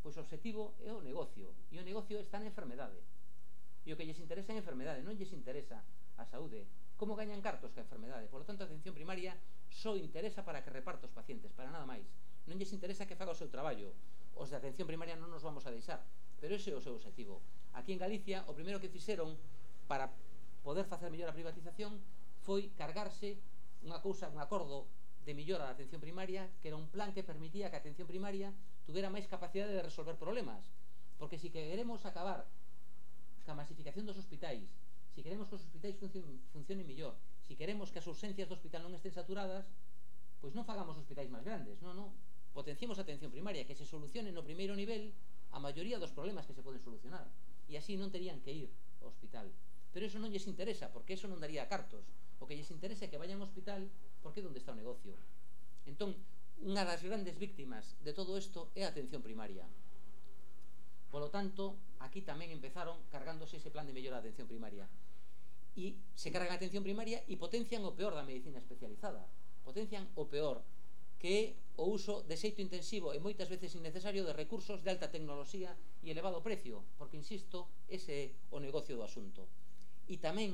Pois o obxectivo é o negocio, e o negocio está na enfermedade. E o que lles interesa é a enfermedade, non lles interesa a saúde. Como gañan cartos ca enfermedade? Por lo tanto, a atención primaria só interesa para que reparta os pacientes, para nada máis. Non lles interesa que faga o seu traballo. Os de atención primaria non nos vamos a deixar, pero ese é o seu obxectivo. Aquí en Galicia, o primeiro que fixeron para poder facer mellor a privatización foi cargarse unha cousa, un acordo de millora da atención primaria, que era un plan que permitía que a atención primaria tuvera máis capacidade de resolver problemas. Porque se queremos acabar ca masificación dos hospitais, se queremos que os hospitais funcionen, funcionen millor, se queremos que as urxencias do hospital non estén saturadas, pois non fagamos hospitais máis grandes, non, non. Potenciemos a atención primaria, que se solucione no primeiro nivel a maioría dos problemas que se poden solucionar, e así non terían que ir ao hospital. Pero eso non lles interesa, porque eso non daría cartos. O que lles interesa é que vayan ao hospital, porque é onde está o negocio. Entón, unha das grandes víctimas de todo isto é a atención primaria. Polo tanto, aquí tamén empezaron cargándose ese plan de mellora da atención primaria. E se cargan a atención primaria e potencian o peor da medicina especializada. Potencian o peor, que é o uso de xeito intensivo e moitas veces innecesario de recursos de alta tecnoloxía e elevado precio, porque, insisto, ese é o negocio do asunto. E tamén,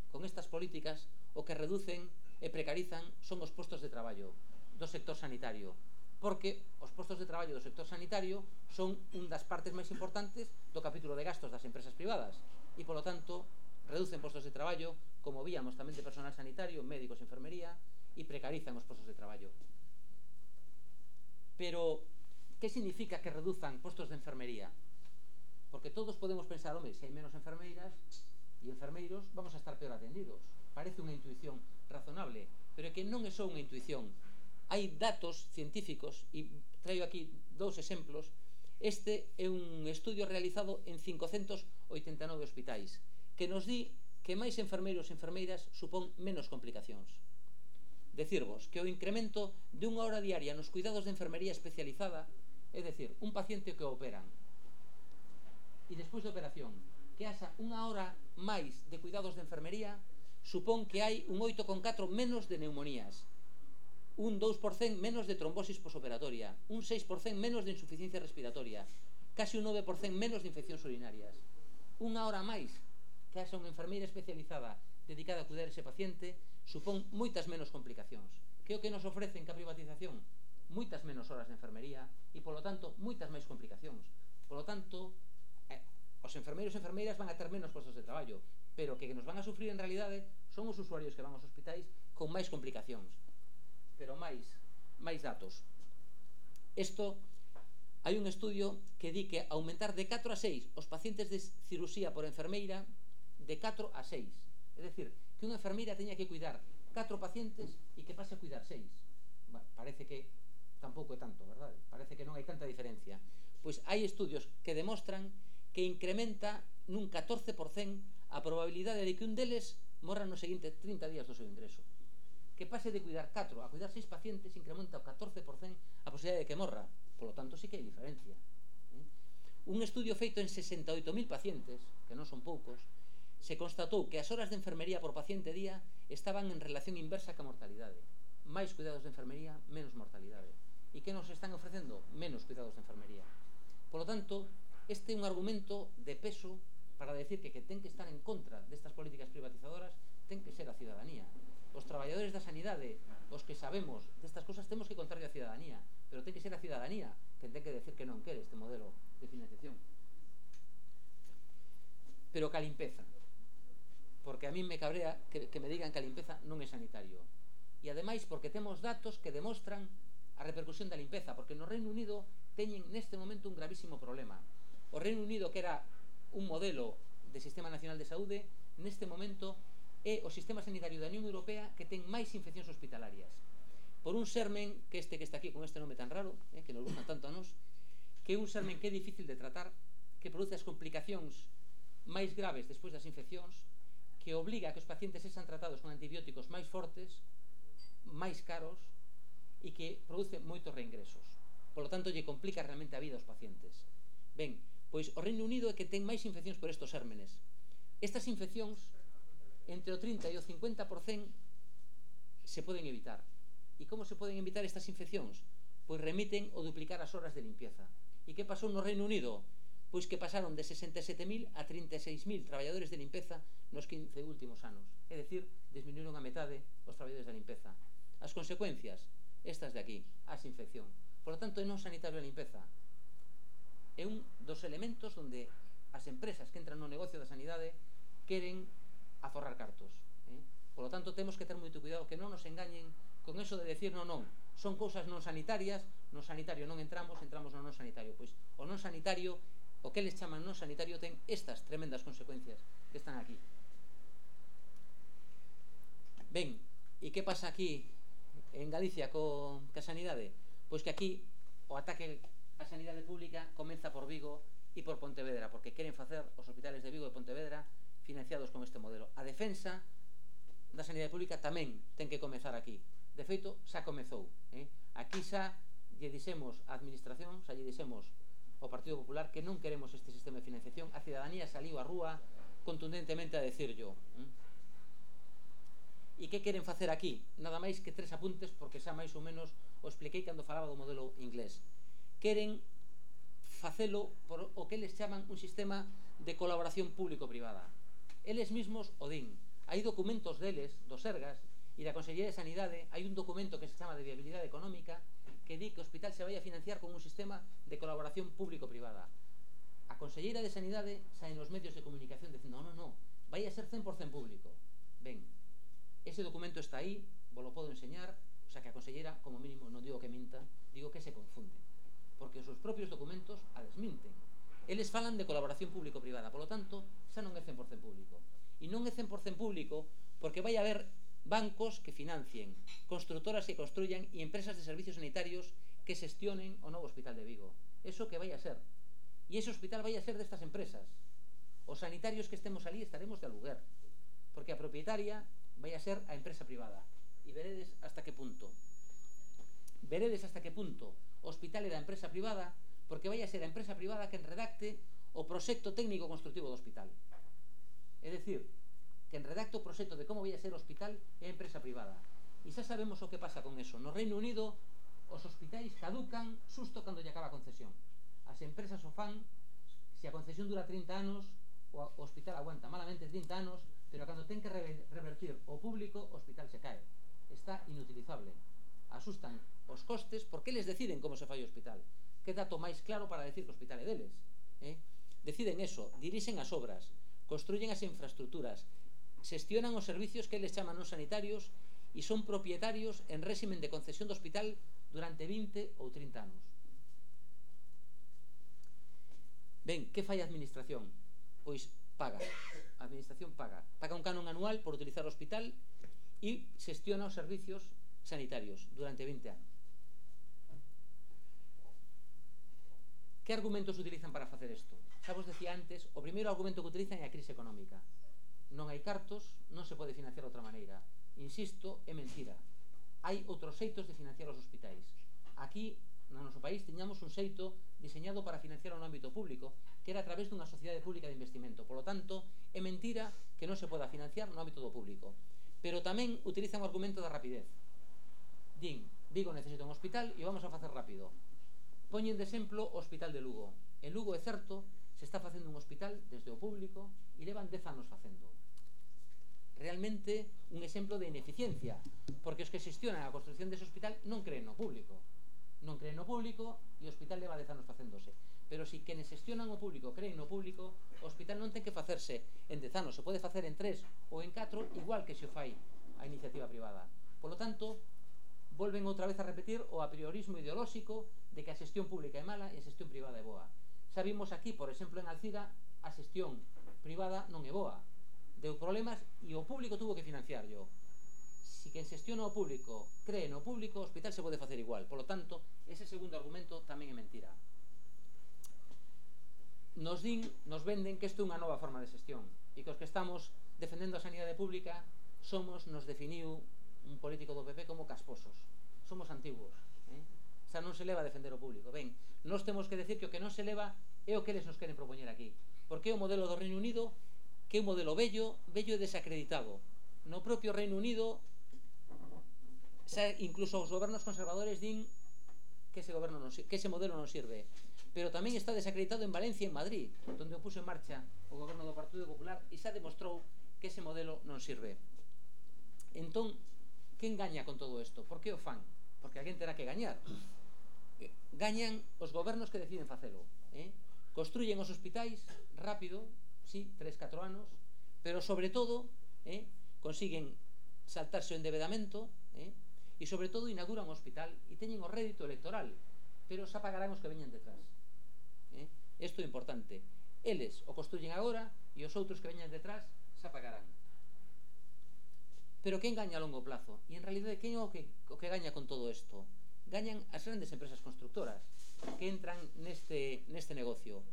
con estas políticas, o que reducen e precarizan son os postos de traballo do sector sanitario, porque os postos de traballo do sector sanitario son un das partes máis importantes do capítulo de gastos das empresas privadas e, polo tanto, reducen postos de traballo, como víamos tamén de personal sanitario, médicos, enfermería, e precarizan os postos de traballo. Pero, que significa que reduzan postos de enfermería? Porque todos podemos pensar, home, se hai menos enfermeiras e enfermeiros, vamos a estar peor atendidos. Parece unha intuición razonable, pero é que non é só unha intuición. Hai datos científicos, e traio aquí dous exemplos. Este é un estudio realizado en cincocentos oitenta e nove hospitais, que nos di que máis enfermeiros e enfermeiras supón menos complicacións. Decirvos que o incremento de unha hora diaria nos cuidados de enfermería especializada, é dicir, un paciente que o operan e despois de operación que haxa unha hora máis de cuidados de enfermería, supón que hai un oito coma catro menos de neumonías, un dous por cento menos de trombosis posoperatoria, un seis por cento menos de insuficiencia respiratoria, casi un nove por cento menos de infeccións urinarias. Unha hora máis que haxa unha enfermeira especializada dedicada a cuidar ese paciente supón moitas menos complicacións. Que é o que nos ofrecen ca privatización? Moitas menos horas de enfermería e, polo tanto, moitas máis complicacións. Polo tanto, eh, os enfermeiros e enfermeiras van a ter menos postos de traballo, pero que nos van a sufrir en realidade son os usuarios que van aos hospitais con máis complicacións. Pero máis, máis datos. Isto, hai un estudio que di que aumentar de catro a seis os pacientes de cirurxía por enfermeira, de catro a seis. É dicir, que unha enfermeira teña que cuidar catro pacientes e que pase a cuidar seis. Bueno, parece que tampouco é tanto, verdade? Parece que non hai tanta diferencia. Pois hai estudios que demostran que incrementa nun catorce por cento a probabilidade de que un deles morra nos seguintes trinta días do seu ingreso. Que pase de cuidar catro a cuidar seis pacientes incrementa o catorce por cento a posibilidade de que morra. Por lo tanto, sí que hai diferencia. Un estudio feito en sesenta e oito mil pacientes, que non son poucos, se constatou que as horas de enfermería por paciente día estaban en relación inversa ca mortalidade. Máis cuidados de enfermería, menos mortalidade. E que nos están ofrecendo? Menos cuidados de enfermería. Por lo tanto, este é un argumento de peso para decir que que ten que estar en contra destas políticas privatizadoras ten que ser a cidadanía. Os traballadores da sanidade, os que sabemos destas cosas, temos que contarlle a cidadanía, pero ten que ser a cidadanía que ten que decir que non quere este modelo de financiación. pero que a limpeza, porque a mí me cabrea que, que me digan que a limpeza non é sanitario, e ademais porque temos datos que demostran a repercusión da limpeza, porque no Reino Unido teñen neste momento un gravísimo problema. O Reino Unido, que era un modelo de Sistema Nacional de Saúde, neste momento é o sistema sanitario da Unión Europea que ten máis infeccións hospitalarias, por un sermen, que este que está aquí con este nome tan raro, eh, que nos gusta tanto a nos, que é un sermen que é difícil de tratar, que produce as complicacións máis graves despois das infeccións, que obliga a que os pacientes sexan tratados con antibióticos máis fortes, máis caros, e que produce moitos reingresos. Por lo tanto, lle complica realmente a vida aos pacientes. Ben, pois o Reino Unido é que ten máis infeccións por estos sérmenes. Estas infeccións, entre o trinta e o cincuenta por cento, se poden evitar. E como se poden evitar estas infeccións? Pois remiten o duplicar as horas de limpieza. E que pasou no Reino Unido? Pois que pasaron de sesenta e sete mil a trinta e seis mil traballadores de limpeza nos quince últimos anos. É dicir, disminuíron a metade os traballadores da limpeza. As consecuencias, estas de aquí, as infección. Por lo tanto, é non sanitario a limpeza. É un dos elementos onde as empresas que entran no negocio da sanidade queren aforrar cartos. Eh? Por lo tanto, temos que ter moito cuidado que non nos engañen con eso de decir non, non, son cousas non sanitarias, no sanitario non entramos, entramos no non sanitario. Pois o non sanitario, o que les chaman non sanitario, ten estas tremendas consecuencias que están aquí. Ben, e que pasa aquí en Galicia co, ca sanidade? Pois que aquí o ataque á sanidade pública comeza por Vigo e por Pontevedra, porque queren facer os hospitales de Vigo e Pontevedra financiados con este modelo. A defensa da sanidade pública tamén ten que comezar aquí. De feito, xa comezou. Eh? Aquí xa lle dixemos a administración, xa lle dixemos ao Partido Popular que non queremos este sistema de financiación. A cidadanía saliu á rúa contundentemente a decirlo. Eh? E que queren facer aquí? Nada máis que tres apuntes, porque xa máis ou menos o expliquei cando falaba do modelo inglés. Queren facelo por o que eles chaman un sistema de colaboración público-privada. Eles mismos o din. Hai documentos deles, dos Sergas e da Consellería de Sanidade, hai un documento que se chama de viabilidade económica que di que o hospital se vai a financiar con un sistema de colaboración público-privada. A Conselleira de Sanidade sae nos medios de comunicación dicindo non, non, non, vai a ser cen por cento público. Ben, ese documento está aí, vos lo podo enseñar, o sea que a Conselleira, como mínimo, non digo que minta, digo que se confunde, porque os seus propios documentos a desminten. Eles falan de colaboración público-privada, polo tanto, xa non é cen por cento público. E non é cen por cento público porque vai haber bancos que financien, constructoras que construyan e empresas de servicios sanitarios que xestionen o novo hospital de Vigo. Eso que vai a ser. E ese hospital vai a ser destas empresas. Os sanitarios que estemos ali estaremos de aluguer, porque a propietaria vai a ser a empresa privada. E veredes hasta que punto. Veredes hasta que punto o hospital é da empresa privada, porque vai a ser a empresa privada que redacte o proxecto técnico constructivo do hospital. É dicir, que en redacto o proxecto de como vai a ser o hospital é a empresa privada. E xa sabemos o que pasa con eso. No Reino Unido, os hospitais caducan xusto cando lle acaba a concesión. As empresas o fan, se a concesión dura trinta anos, o hospital aguanta malamente trinta anos, pero cando ten que revertir o público, o hospital se cae. Está inutilizable. Asustan os costes porque eles deciden como se fai o hospital. Que dato máis claro para decir que o hospital é deles? Eh? Deciden eso, dirixen as obras, construyen as infraestructuras, xestionan os servicios que eles chaman non sanitarios e son propietarios en réximen de concesión do hospital durante vinte ou trinta anos. Ben, que fai a administración? Pois paga. A administración paga. Paga un canon anual por utilizar o hospital e xestiona os servicios sanitarios durante vinte anos. Que argumentos utilizan para facer isto? Xa vos decía antes, o primeiro argumento que utilizan é a crise económica. Non hai cartos, non se pode financiar de outra maneira. Insisto, é mentira. Hai outros xeitos de financiar os hospitais. Aquí, no noso país, tiñamos un xeito diseñado para financiar no ámbito público, que era a través dunha sociedade pública de investimento. Por lo tanto, é mentira que non se poda financiar no ámbito do público. Pero tamén utilizan o argumento da rapidez. Din, Vigo necesita un hospital e vamos a facer rápido. Poñen de exemplo o Hospital de Lugo. En Lugo, é certo, se está facendo un hospital desde o público e levan dez anos facendo. Realmente un exemplo de ineficiencia, porque os que xestionan a construcción dese hospital non creen no público. Non creen no público e o hospital leva dez anos facéndose. pero si quenes xestionan o público creen no público, o hospital non ten que facerse en dez anos, se pode facer en tres ou en catro, igual que se o fai a iniciativa privada. Polo tanto, volven outra vez a repetir o apriorismo ideolóxico de que a xestión pública é mala e a xestión privada é boa. Xa vimos aquí, por exemplo, en Alcira, a xestión privada non é boa, deu problemas e o público tuvo que financiarlo. Si quen xestiona o público cree no público, o hospital se pode facer igual. Polo tanto, ese segundo argumento tamén é mentira. Nos din, nos venden que isto é unha nova forma de xestión e que os que estamos defendendo a sanidade pública somos, nos definiu un político do P P como casposos. Somos antiguos, eh? Xa non se leva a defender o público. Ben, nós temos que decir que o que non se leva é o que eles nos queren propoñer aquí, porque é o modelo do Reino Unido, que é un modelo bello, bello e desacreditado. No propio Reino Unido, xa incluso os gobernos conservadores din que ese, goberno non, que ese modelo non sirve. Pero tamén está desacreditado en Valencia e en Madrid, onde o puso en marcha o goberno do Partido Popular e xa demostrou que ese modelo non sirve. Entón, que engaña con todo isto? Por que o fan? Porque alguén terá que gañar. Gañan os gobernos que deciden facelo, eh? Construyen os hospitais rápido, sí, tres, catro anos, pero sobre todo eh, consiguen saltarse o endebedamento, eh? E sobre todo inauguran o hospital e teñen o rédito electoral, pero xa pagarán os que veñan detrás. Eh? Isto é importante. Eles o construyen agora e os outros que veñan detrás xa pagarán. Pero quen gaña a longo plazo? E en realidade, quen é o que, o que gaña con todo isto? Gañan as grandes empresas constructoras que entran neste, neste negocio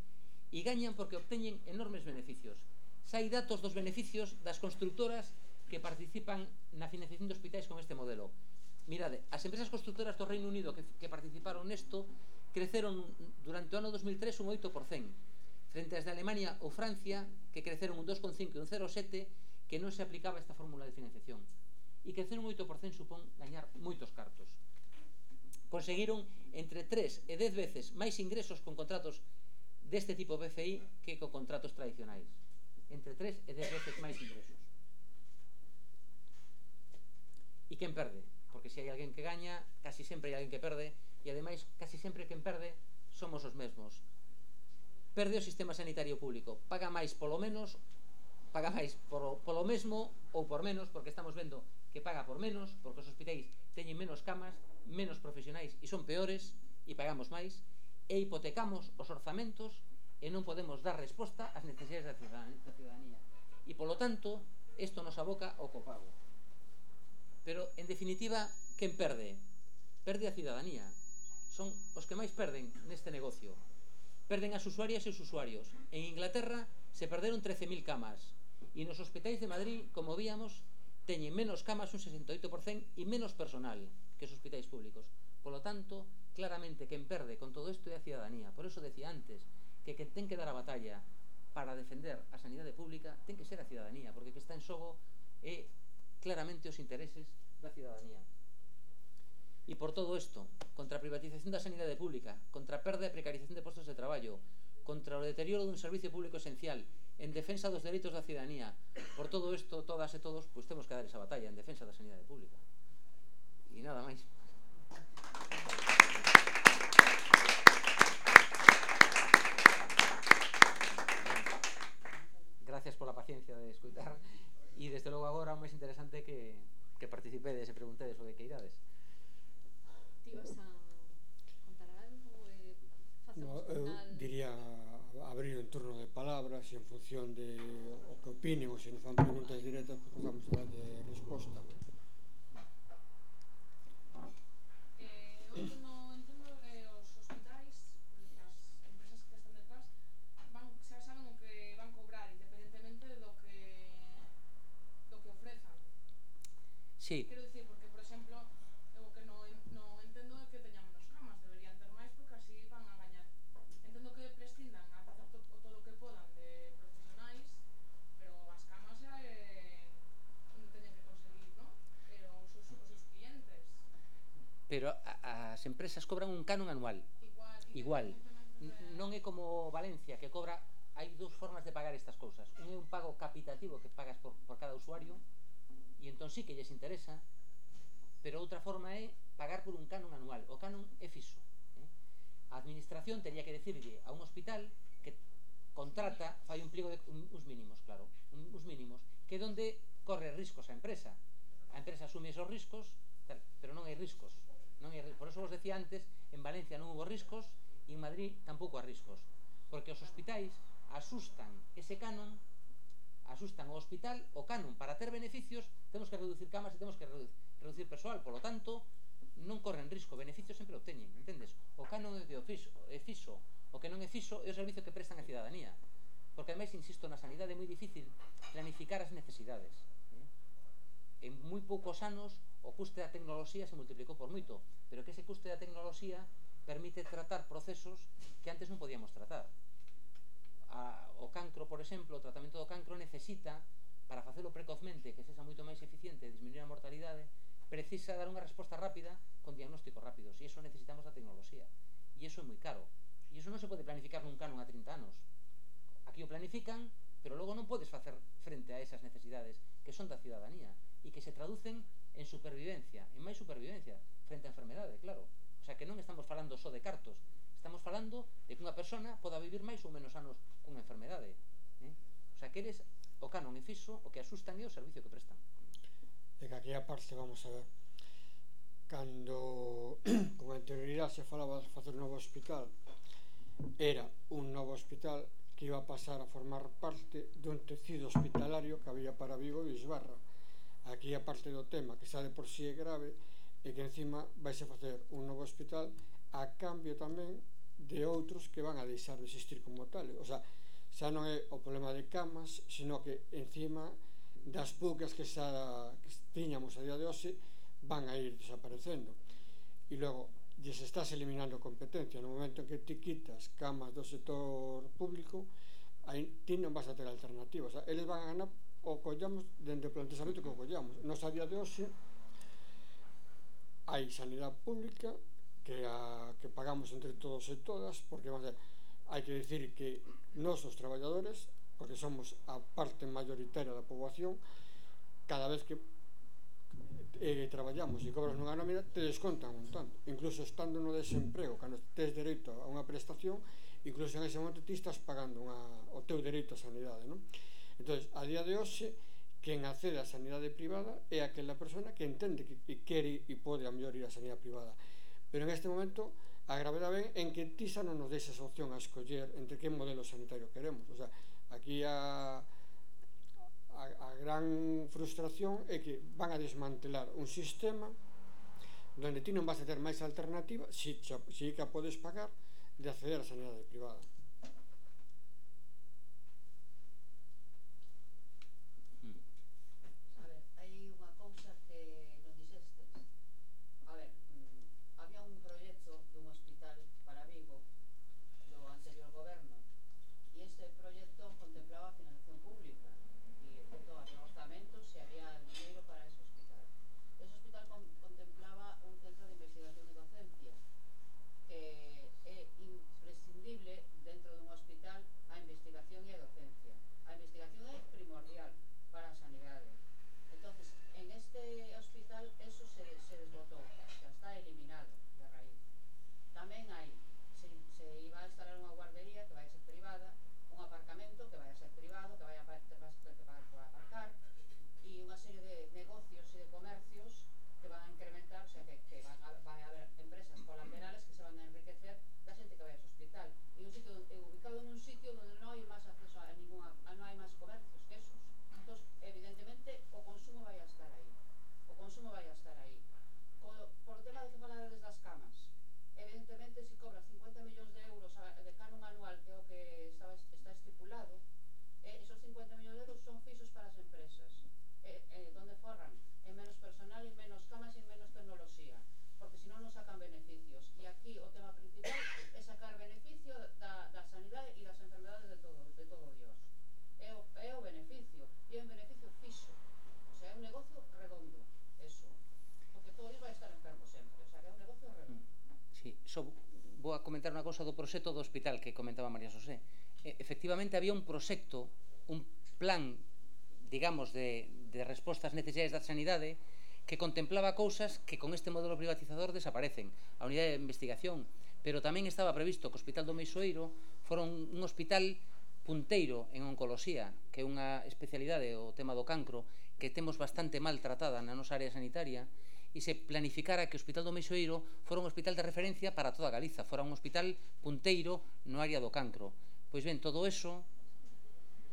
e gañan porque obteñen enormes beneficios. Xa hai datos dos beneficios das constructoras que participan na financiación de hospitais con este modelo. Mirade, as empresas constructoras do Reino Unido que, que participaron nesto creceron durante o ano dos mil tres un oito por cento, frente ás de Alemania ou Francia, que creceron un dos coma cinco e un cero coma sete, que non se aplicaba esta fórmula de financiación. E crecer un oito por cento supón gañar moitos cartos. Conseguiron entre tres e dez veces máis ingresos con contratos deste tipo B F I que con contratos tradicionais. Entre tres e dez veces máis ingresos. E quen perde? Porque se hai alguén que gaña, casi sempre hai alguén que perde, e ademais, casi sempre quen perde somos os mesmos. Perde o sistema sanitario público, paga máis polo menos, paga máis polo, polo mesmo ou por menos, porque estamos vendo que paga por menos, porque os hospitais teñen menos camas, menos profesionais e son peores, e pagamos máis, e hipotecamos os orzamentos e non podemos dar resposta ás necesidades da ciudadanía. E polo tanto, isto nos aboca ao copago. Pero, en definitiva, quen perde? Perde a ciudadanía. Son os que máis perden neste negocio. Perden as usuarias e os usuarios. En Inglaterra se perderon trece mil camas e nos hospitais de Madrid, como víamos, teñen menos camas, un sesenta e oito por cento, e menos personal que os hospitais públicos. Polo tanto, claramente, quen perde con todo isto é a ciudadanía. Por eso decía antes que quen ten que dar a batalla para defender a sanidade pública ten que ser a ciudadanía, porque que está en xogo é claramente os intereses da ciudadanía. E por todo isto, contra a privatización da sanidade pública, contra a perda e precarización de postos de traballo, contra o deterioro dun servicio público esencial, en defensa dos dereitos da ciudadanía, por todo isto, todas e todos, pois temos que dar esa batalla en defensa da sanidade pública. E nada máis. Gracias pola paciencia de escutar. E desde logo agora o máis interesante que, que participedes e preguntedes o que queirades. Ti vas a contar algo e facemos No, eu final? diría abrir un turno de palabras e en función de o que opinen ou se nos fan preguntas directas, pues vamos a dar de resposta. Eh, eu non entendo eh, os hospitais, as empresas que están detrás, van, xa saben o que van cobrar independentemente do que do que ofrezan. Sí. Quero dicir, porque, por exemplo, eu o que non, non entendo é que teñan menos camas, deberían ter máis porque así van a gañar. Entendo que prescindan a facer to, o todo o que podan de profesionais, pero as camas xa é onde teñen que conseguir, non? Pero os seus, os seus clientes. Pero a, as empresas cobran un canon anual. Igual. Igual. Non é como Valencia, que cobra. Hai dúas formas de pagar estas cousas. Un é un pago capitativo que pagas por, por cada usuario, e entón sí que lles interesa, pero outra forma é pagar por un canon anual. O canon é fixo. Eh? A administración tería que decirlle a un hospital que contrata, fai un pliego de un, uns mínimos, claro, un, uns mínimos, que é onde corre riscos a empresa. A empresa asume esos riscos, tal, pero non hai riscos. Non hai, por eso vos decía antes, en Valencia non hubo riscos e en Madrid tampouco hai riscos. Porque os hospitais asustan ese canon, asustan o hospital, o canon, para ter beneficios, temos que reducir camas e temos que reducir, reducir persoal, polo tanto, non corren risco, beneficios sempre o teñen, entendes? O canon é, de ofiso, é fixo, o que non é fixo é o servicio que prestan a cidadanía. Porque, ademais, insisto, na sanidade é moi difícil planificar as necesidades. Eh? En moi poucos anos, o custe da tecnoloxía se multiplicou por moito, pero que ese custe da tecnoloxía permite tratar procesos que antes non podíamos tratar. A, o cancro, por exemplo, o tratamento do cancro necesita, para facelo precozmente, que sexa moito máis eficiente e disminuir a mortalidade, precisa dar unha resposta rápida con diagnósticos rápidos, e iso necesitamos da tecnoloxía, e iso é moi caro, e iso non se pode planificar nun canon a trinta anos. Aquí o planifican, pero logo non podes facer frente a esas necesidades que son da cidadanía e que se traducen en supervivencia, en máis supervivencia frente a enfermedade, claro. O sea, que non estamos falando só de cartos, estamos falando de que unha persona poda vivir máis ou menos anos cunha enfermedade. Eh? O sea, que eres o canon e fixo, o que asustan é o servicio que prestan. E que aquí aparte, vamos a ver, cando con anterioridade se falaba de facer un novo hospital, era un novo hospital que iba a pasar a formar parte dun tecido hospitalario que había para Vigo e Bisbarra. Aquí a parte do tema, que xa de por si é grave, e que encima vais a facer un novo hospital a cambio tamén de outros que van a deixar de existir como tal. O sea, xa non é o problema de camas, sino que encima das poucas que xa que tiñamos a día de hoxe van a ir desaparecendo. E logo, lles estás eliminando competencia. No momento en que ti quitas camas do sector público, aí ti non vas a ter alternativa. O sea, eles van a ganar o collamos dende o planteamento que o collamos. Nos a día de hoxe hai sanidade pública que a que pagamos entre todos e todas, porque vamos a ver, hai que decir que nós os traballadores, porque somos a parte mayoritaria da poboación, cada vez que eh, traballamos e cobras nunha nómina te descontan un tanto, incluso estando no desemprego, cando tes dereito a unha prestación, incluso en ese momento ti estás pagando unha, o teu dereito a sanidade, non? Entón, a día de hoxe, quen accede á sanidade privada é aquela persona que entende que, que quere e pode a mellor ir á sanidade privada, pero en este momento a gravedade ven en que ti xa non nos deixas opción a escoller entre que modelo sanitario queremos. O sea, aquí a, a, a gran frustración é que van a desmantelar un sistema donde ti non vas a ter máis alternativa, si, si que a podes pagar, de acceder á sanidade privada. Só vou a comentar unha cousa do proxecto do hospital que comentaba María Xosé. E, efectivamente, había un proxecto, un plan, digamos, de, de resposta ás necesidades da sanidade que contemplaba cousas que con este modelo privatizador desaparecen. A unidade de investigación, pero tamén estaba previsto que o Hospital do Meixoeiro fora un, un hospital punteiro en oncoloxía, que é unha especialidade, o tema do cancro, que temos bastante mal tratada na nosa área sanitaria, e se planificara que o Hospital do Meixoeiro fora un hospital de referencia para toda Galiza, fora un hospital punteiro no área do cancro. Pois ben, todo eso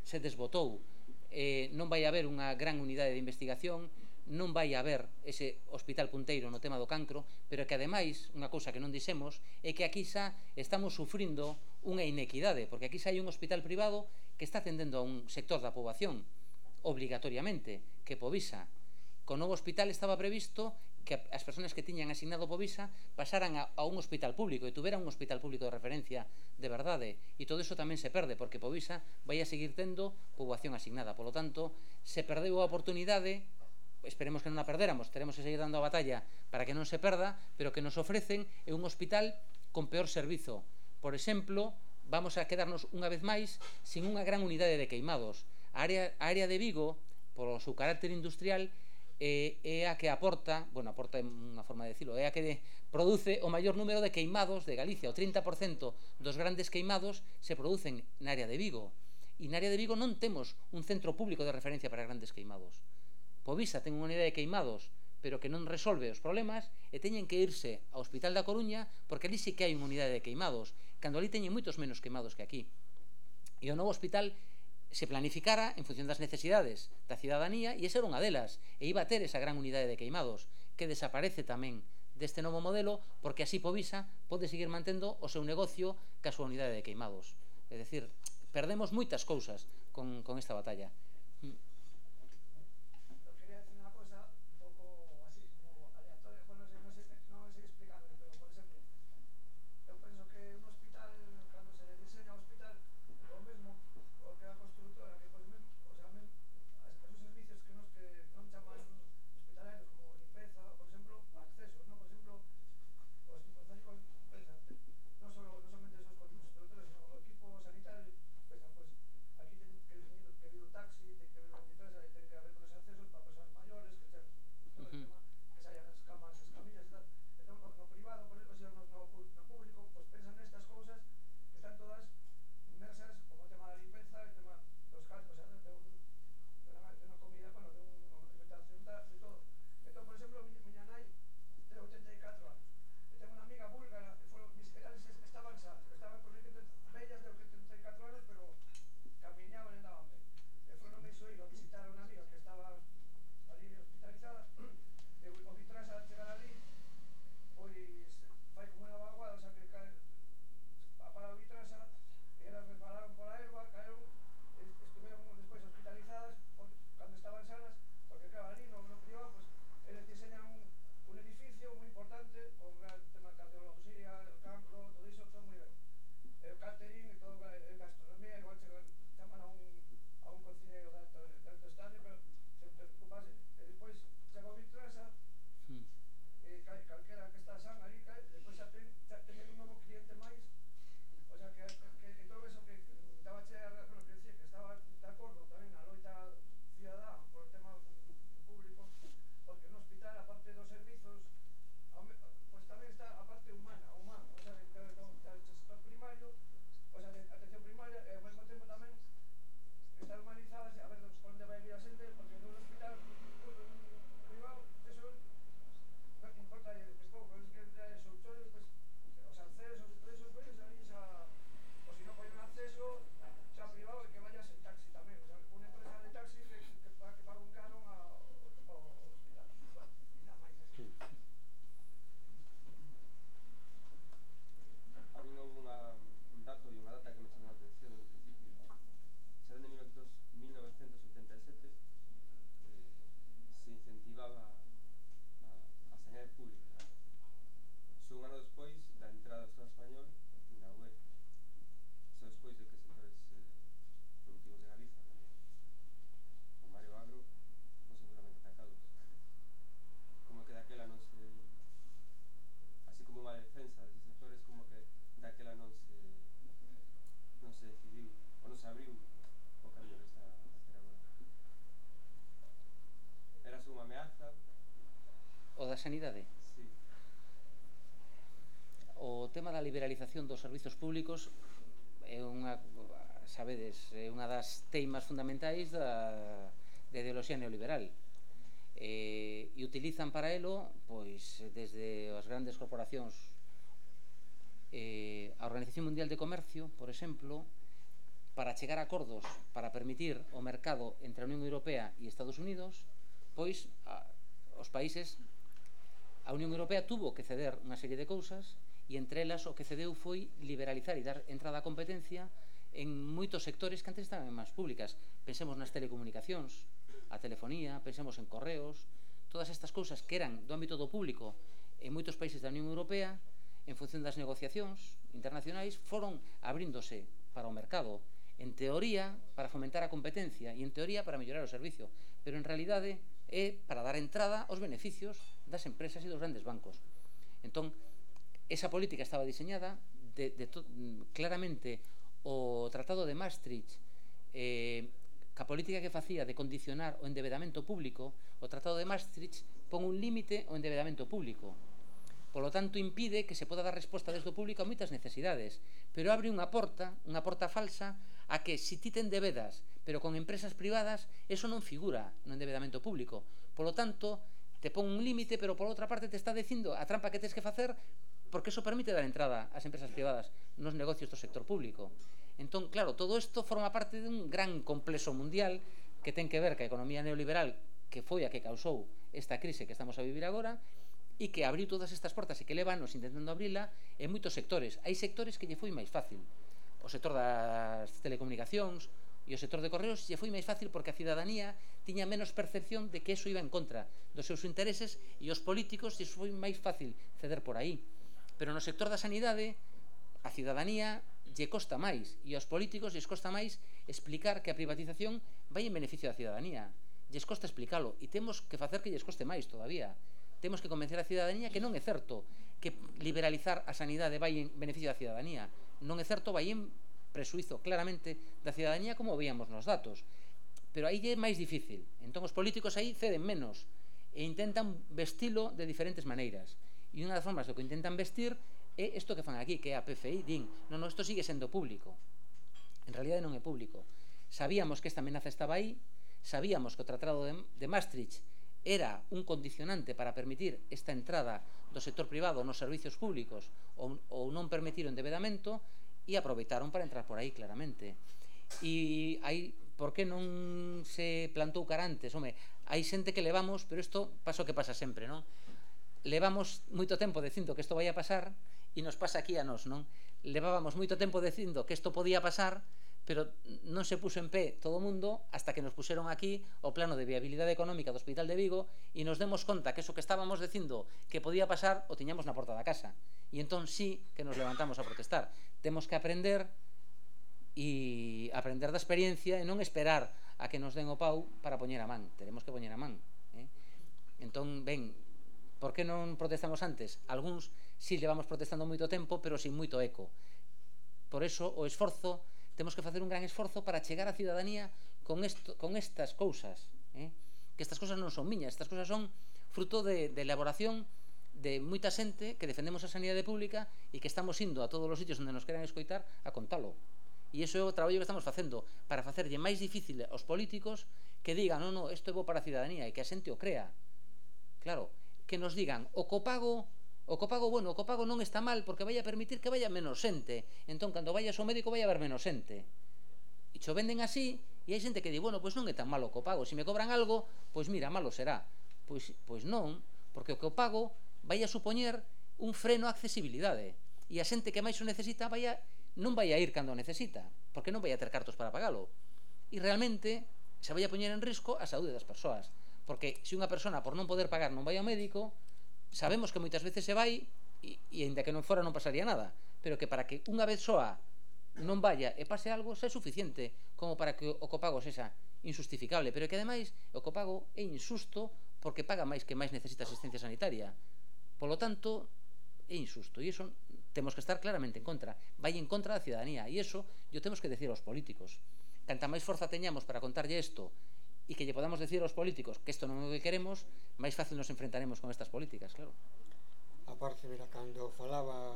se desbotou. Eh, non vai haber unha gran unidade de investigación, non vai haber ese hospital punteiro no tema do cancro, pero que ademais, unha cousa que non dixemos, é que aquí xa estamos sufrindo unha inequidade, porque aquí xa hai un hospital privado que está atendendo a un sector da poboación obligatoriamente, que Povisa. Con o novo hospital estaba previsto que as persoas que tiñan asignado Povisa pasaran a, a un hospital público e tuveran un hospital público de referencia de verdade, e todo iso tamén se perde porque Povisa vai a seguir tendo poboación asignada. Por lo tanto, se perdeu a oportunidade, esperemos que non a perderamos, teremos que seguir dando a batalla para que non se perda, pero que nos ofrecen é un hospital con peor servizo. Por exemplo, vamos a quedarnos unha vez máis sin unha gran unidade de queimados. A área, a área de Vigo, polo seu carácter industrial, é, é a que aporta, bueno, aporta unha forma de decirlo, é a que de, produce o maior número de queimados de Galicia. O trinta por cento dos grandes queimados se producen na área de Vigo. E na área de Vigo non temos un centro público de referencia para grandes queimados. Povisa ten unha unidade de queimados, pero que non resolve os problemas, e teñen que irse ao Hospital da Coruña, porque ali sí que hai unha unidade de queimados, cando ali teñen moitos menos queimados que aquí. E o novo hospital se planificara en función das necesidades da cidadanía, e esa era unha delas, e iba a ter esa gran unidade de queimados, que desaparece tamén deste novo modelo, porque así Povisa pode seguir mantendo o seu negocio ca súa unidade de queimados. É dicir, perdemos moitas cousas con, con esta batalla. Sanidade. Sí. O tema da liberalización dos servizos públicos é unha, sabedes, é unha das teimas fundamentais da, da ideoloxía neoliberal. E, e utilizan para elo, pois, desde as grandes corporacións, eh, a Organización Mundial de Comercio, por exemplo, para chegar a acordos para permitir o mercado entre a Unión Europea e Estados Unidos, pois a, os países, a Unión Europea tuvo que ceder unha serie de cousas e entre elas o que cedeu foi liberalizar e dar entrada á competencia en moitos sectores que antes estaban máis públicas. Pensemos nas telecomunicacións, a telefonía, pensemos en correos, todas estas cousas que eran do ámbito do público en moitos países da Unión Europea, en función das negociacións internacionais, foron abríndose para o mercado, en teoría para fomentar a competencia e en teoría para mellorar o servicio, pero en realidade é para dar entrada aos beneficios das empresas e dos grandes bancos. Entón, esa política estaba diseñada de, de to, claramente o Tratado de Maastricht, eh, ca política que facía de condicionar o endebedamento público, o Tratado de Maastricht pon un límite ao endebedamento público. Polo tanto, impide que se poda dar resposta desde o público a moitas necesidades, pero abre unha porta, unha porta falsa, a que se ti te endebedas, pero con empresas privadas, eso non figura no endebedamento público. Polo tanto, te pon un límite, pero por outra parte te está dicindo a trampa que tens que facer, porque eso permite dar entrada ás empresas privadas nos negocios do sector público. Entón, claro, todo isto forma parte dun gran complexo mundial que ten que ver ca economía neoliberal, que foi a que causou esta crise que estamos a vivir agora, e que abriu todas estas portas e que levanos intentando abrila en moitos sectores. Hai sectores que lle foi máis fácil. O sector das telecomunicacións e o sector de correos lle foi máis fácil porque a cidadanía tiña menos percepción de que eso iba en contra dos seus intereses e os políticos lle foi máis fácil ceder por aí. Pero no sector da sanidade a cidadanía lle costa máis e aos políticos lles costa máis explicar que a privatización vai en beneficio da cidadanía. Lles costa explicalo e temos que facer que lles coste máis todavía. Temos que convencer a cidadanía que non é certo que liberalizar a sanidade vai en beneficio da cidadanía. Non é certo, vai en presuizo claramente da cidadanía, como veíamos nos datos. Pero aí é máis difícil. Entón os políticos aí ceden menos e intentan vestilo de diferentes maneiras. E unha das formas do que intentan vestir é isto que fan aquí, que é a P F I. Din, non, non, isto sigue sendo público. En realidade non é público. Sabíamos que esta amenaza estaba aí, sabíamos que o Tratado de, de Maastricht era un condicionante para permitir esta entrada do sector privado nos servicios públicos ou, ou non permitir o endebedamento e aproveitaron para entrar por aí claramente. E aí, por que non se plantou cara antes? Home, hai xente que levamos, pero isto pasa o que pasa sempre, non? Levamos moito tempo dicindo que isto vai a pasar e nos pasa aquí a nós, non? Levábamos moito tempo dicindo que isto podía pasar, pero non se puso en pé todo o mundo hasta que nos puseron aquí o plano de viabilidade económica do Hospital de Vigo e nos demos conta que eso que estábamos dicindo que podía pasar o tiñamos na porta da casa. E entón sí que nos levantamos a protestar. Temos que aprender e aprender da experiencia e non esperar a que nos den o pau para poñer a man. Teremos que poñer a man. Eh? Entón, ben, por que non protestamos antes? Algúns sí levamos protestando moito tempo, pero sin moito eco. Por eso o esforzo, temos que facer un gran esforzo para chegar á cidadanía con, esto, con estas cousas, eh? Que estas cousas non son miñas, estas cousas son fruto de, de elaboración de moita xente que defendemos a sanidade pública e que estamos indo a todos os sitios onde nos queran escoitar a contalo. E iso é o traballo que estamos facendo para facerlle máis difícil aos políticos que digan, non, non, isto é bo para a cidadanía e que a xente o crea. Claro, que nos digan, o copago O copago, bueno, o copago non está mal porque vai a permitir que vaya menos xente. Entón, cando vayas ao médico vai a haber menos xente. E xo venden así, e hai xente que di, bueno, pois non é tan malo o copago. Se me cobran algo, pois mira, malo será. Pois, pois non, porque o copago vai a supoñer un freno á accesibilidade. E a xente que máis o necesita vai a, non vai a ir cando o necesita, porque non vai a ter cartos para pagalo. E realmente se vai a poñer en risco a saúde das persoas. Porque se unha persona por non poder pagar non vai ao médico, sabemos que moitas veces se vai e, e ainda que non fora non pasaría nada, pero que para que unha vez soa non vaya e pase algo xa é suficiente como para que o copago sexa injustificable, pero que ademais o copago é injusto porque paga máis que máis necesita asistencia sanitaria. Polo tanto, é injusto e iso temos que estar claramente en contra, vai en contra da cidadanía e iso yo temos que decir aos políticos. Canta máis forza teñamos para contarlle isto e que lle podamos decir aos políticos que isto non é o que queremos, máis fácil nos enfrentaremos con estas políticas, claro. A parte, mira, cando falaba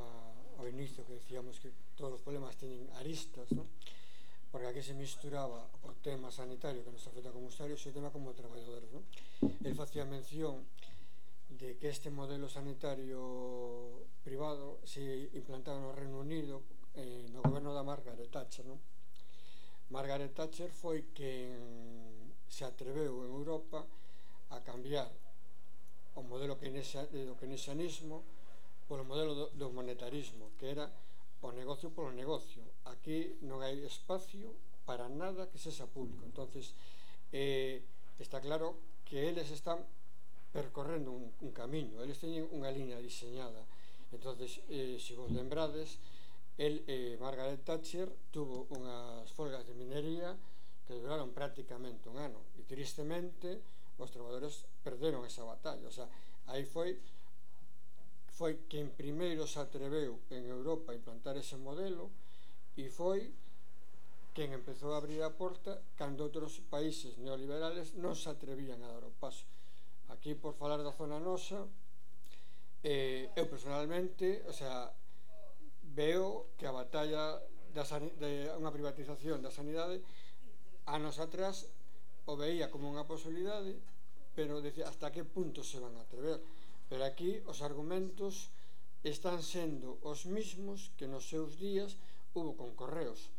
ao inicio que decíamos que todos os problemas teñen aristas, non? Porque aquí se misturaba o tema sanitario que nos afecta como usuarios e o tema como traballadores, non? El facía mención de que este modelo sanitario privado se implantaba no Reino Unido eh, no goberno da Margaret Thatcher, non? Margaret Thatcher foi quen se atreveu en Europa a cambiar o modelo do keynesianismo polo modelo do, do monetarismo, que era o negocio polo negocio. Aquí non hai espacio para nada que sexa público. Entonces, eh, está claro que eles están percorrendo un, un camiño, eles teñen unha liña diseñada. Entonces, eh, se vos lembrades, el, eh, Margaret Thatcher tuvo unhas folgas de minería que duraron prácticamente un ano e tristemente os traballadores perderon esa batalla. O sea, aí foi foi quen primeiro se atreveu en Europa a implantar ese modelo e foi quen empezou a abrir a porta cando outros países neoliberales non se atrevían a dar o paso. Aquí, por falar da zona nosa, eh, eu personalmente, o sea, veo que a batalla da de unha privatización da sanidade anos atrás o veía como unha posibilidade, pero decía hasta que punto se van a atrever. Pero aquí os argumentos están sendo os mismos que nos seus días hubo con Correos.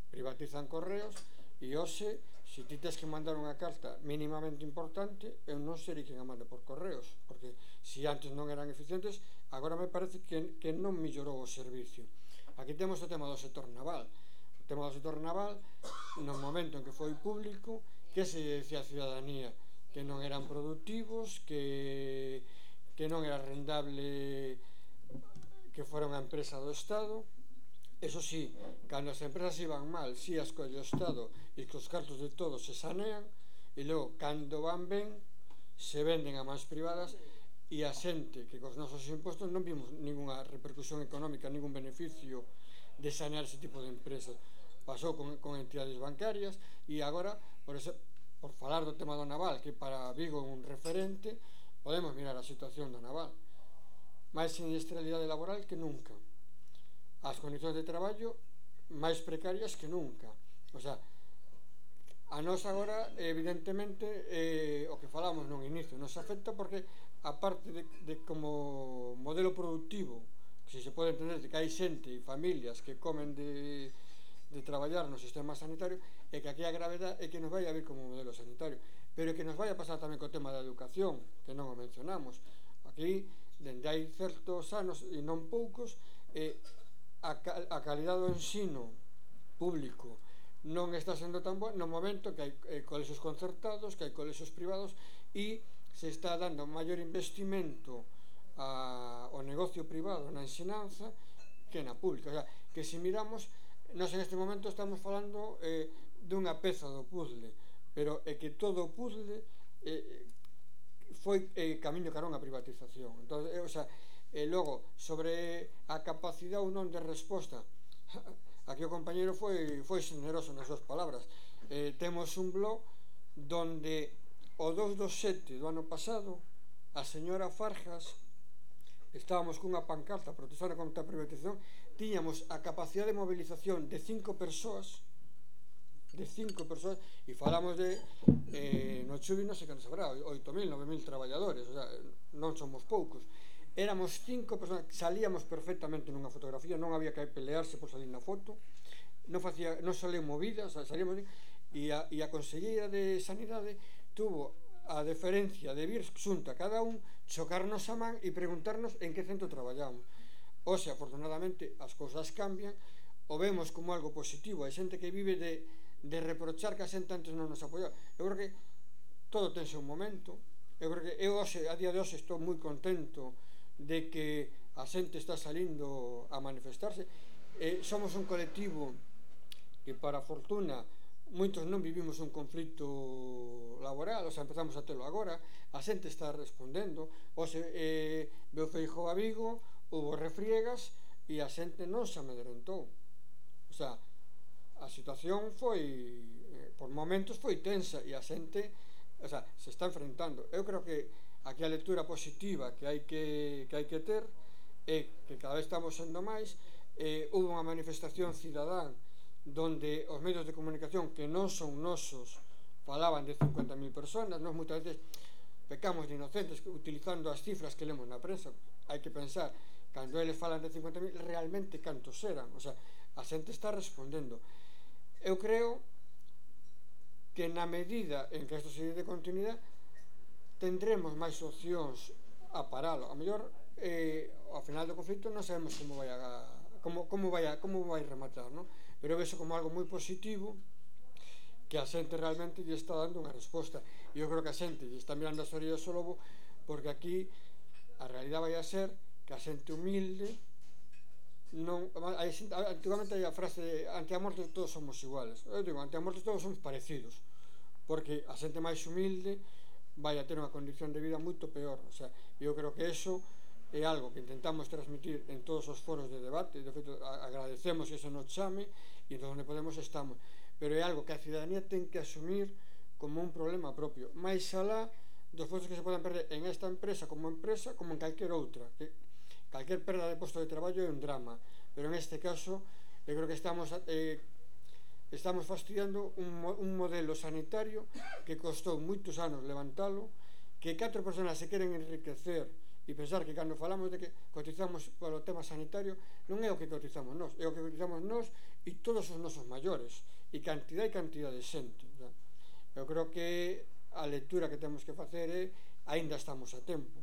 Privatizan Correos e hoxe, se ti tes que mandar unha carta mínimamente importante, eu non serei quen a mande por Correos, porque se antes non eran eficientes, agora me parece que, que non mellorou o servicio. Aquí temos o tema do sector naval. O tema do sector naval, no momento en que foi público, que se decía a ciudadanía que non eran productivos, que que non era rendable que fora unha empresa do Estado. Eso sí, cando as empresas iban mal, si as colle o Estado e que os cartos de todos se sanean, e logo, cando van ben, se venden a mans privadas e a xente que cos nosos impostos non vimos ninguna repercusión económica, ningún beneficio de sanear ese tipo de empresas. Pasou con, con entidades bancarias e agora, por, ese, por falar do tema do naval, que para Vigo é un referente, podemos mirar a situación do naval. Máis siniestralidade laboral que nunca. As condicións de traballo máis precarias que nunca. O sea, a nós agora, evidentemente, eh, o que falamos nun inicio, nos afecta porque, aparte de, de como modelo productivo, que se pode entender de que hai xente e familias que comen de, de traballar no sistema sanitario, e que aquí a gravedade é que nos vai a vir como modelo sanitario. Pero que nos vai a pasar tamén co tema da educación, que non o mencionamos. Aquí, dende hai certos anos, e non poucos, eh, a, a calidade do ensino público non está sendo tan boa no momento que hai eh, colexios concertados, que hai colexios privados, e se está dando maior investimento a, ao negocio privado na ensinanza que na pública. O sea, que se miramos, nós en este momento estamos falando eh, dunha peza do puzzle, pero é que todo o puzzle eh, foi eh, camiño cara a unha privatización. Entón, eh, o sea, e logo, sobre a capacidade ou non de resposta, aquí o compañeiro foi, foi generoso nas súas palabras. Eh, temos un blog donde o dous do sete do ano pasado a señora Farjas, estábamos cunha pancarta protestando contra a privatización, tiñamos a capacidade de movilización de cinco persoas de cinco persoas, e falamos de eh, no Chubi non sei que nos habrá oito mil, nove mil traballadores, o sea, non somos poucos. Éramos cinco persoas, salíamos perfectamente nunha fotografía, non había que pelearse por salir na foto, non facía, non saleu movidas, salíamos, e a, e a Conselleira de Sanidade tuvo a deferencia de vir xunta cada un, chocarnos a man e preguntarnos en que centro traballamos. O sea, afortunadamente as cousas cambian, o vemos como algo positivo. Hai xente que vive de, de reprochar que a xente antes non nos apoiaba. Eu creo que todo tense un momento. Eu creo que eu hoxe, a día de hoxe estou moi contento de que a xente está salindo a manifestarse. Eh, somos un colectivo que, para fortuna, moitos non vivimos un conflito laboral, o sea, empezamos a telo agora, a xente está respondendo. Hoxe eh, veu Feijóo a Vigo, houve refriegas e a xente non se amedrentou. O sea, a situación foi, eh, por momentos foi tensa, e a xente, o sea, se está enfrentando. Eu creo que aquí a lectura positiva que hai que, que hai que ter é que cada vez estamos sendo máis. Eh, houve unha manifestación cidadán donde os medios de comunicación que non son nosos falaban de cincuenta mil personas. Nós moitas veces pecamos de inocentes utilizando as cifras que lemos na prensa. Hai que pensar, cando eles falan de cincuenta mil, realmente cantos eran. O sea, a xente está respondendo. Eu creo que na medida en que isto se de continuidade tendremos máis opcións a paralo. A mellor eh, ao final do conflito non sabemos como vai a, como, como vai a, como vai rematar, non? Pero vexo como algo moi positivo, que a xente realmente lle está dando unha resposta. E eu creo que a xente lle está mirando as orillas ao lobo, porque aquí a realidade vai a ser que a xente humilde non, antigamente hai a frase de ante a morte todos somos iguales. Eu digo, ante a morte todos somos parecidos, porque a xente máis humilde vai a ter unha condición de vida moito peor. O sea, eu creo que eso é algo que intentamos transmitir en todos os foros de debate. De feito, agradecemos que se nos chame e onde podemos estamos, pero é algo que a ciudadanía ten que asumir como un problema propio, máis alá dos postos que se poden perder en esta empresa como empresa, como en calquer outra, que calquer perda de posto de traballo é un drama, pero en este caso eu creo que estamos eh, estamos fastidiando un, un modelo sanitario que costou moitos anos levantalo, que catro personas se queren enriquecer e pensar que cando falamos de que cotizamos polo tema sanitario, non é o que cotizamos nós, é o que cotizamos nós e todos os nosos maiores, e cantidad e cantidad de xente. Eu creo que a lectura que temos que facer é aínda estamos a tempo.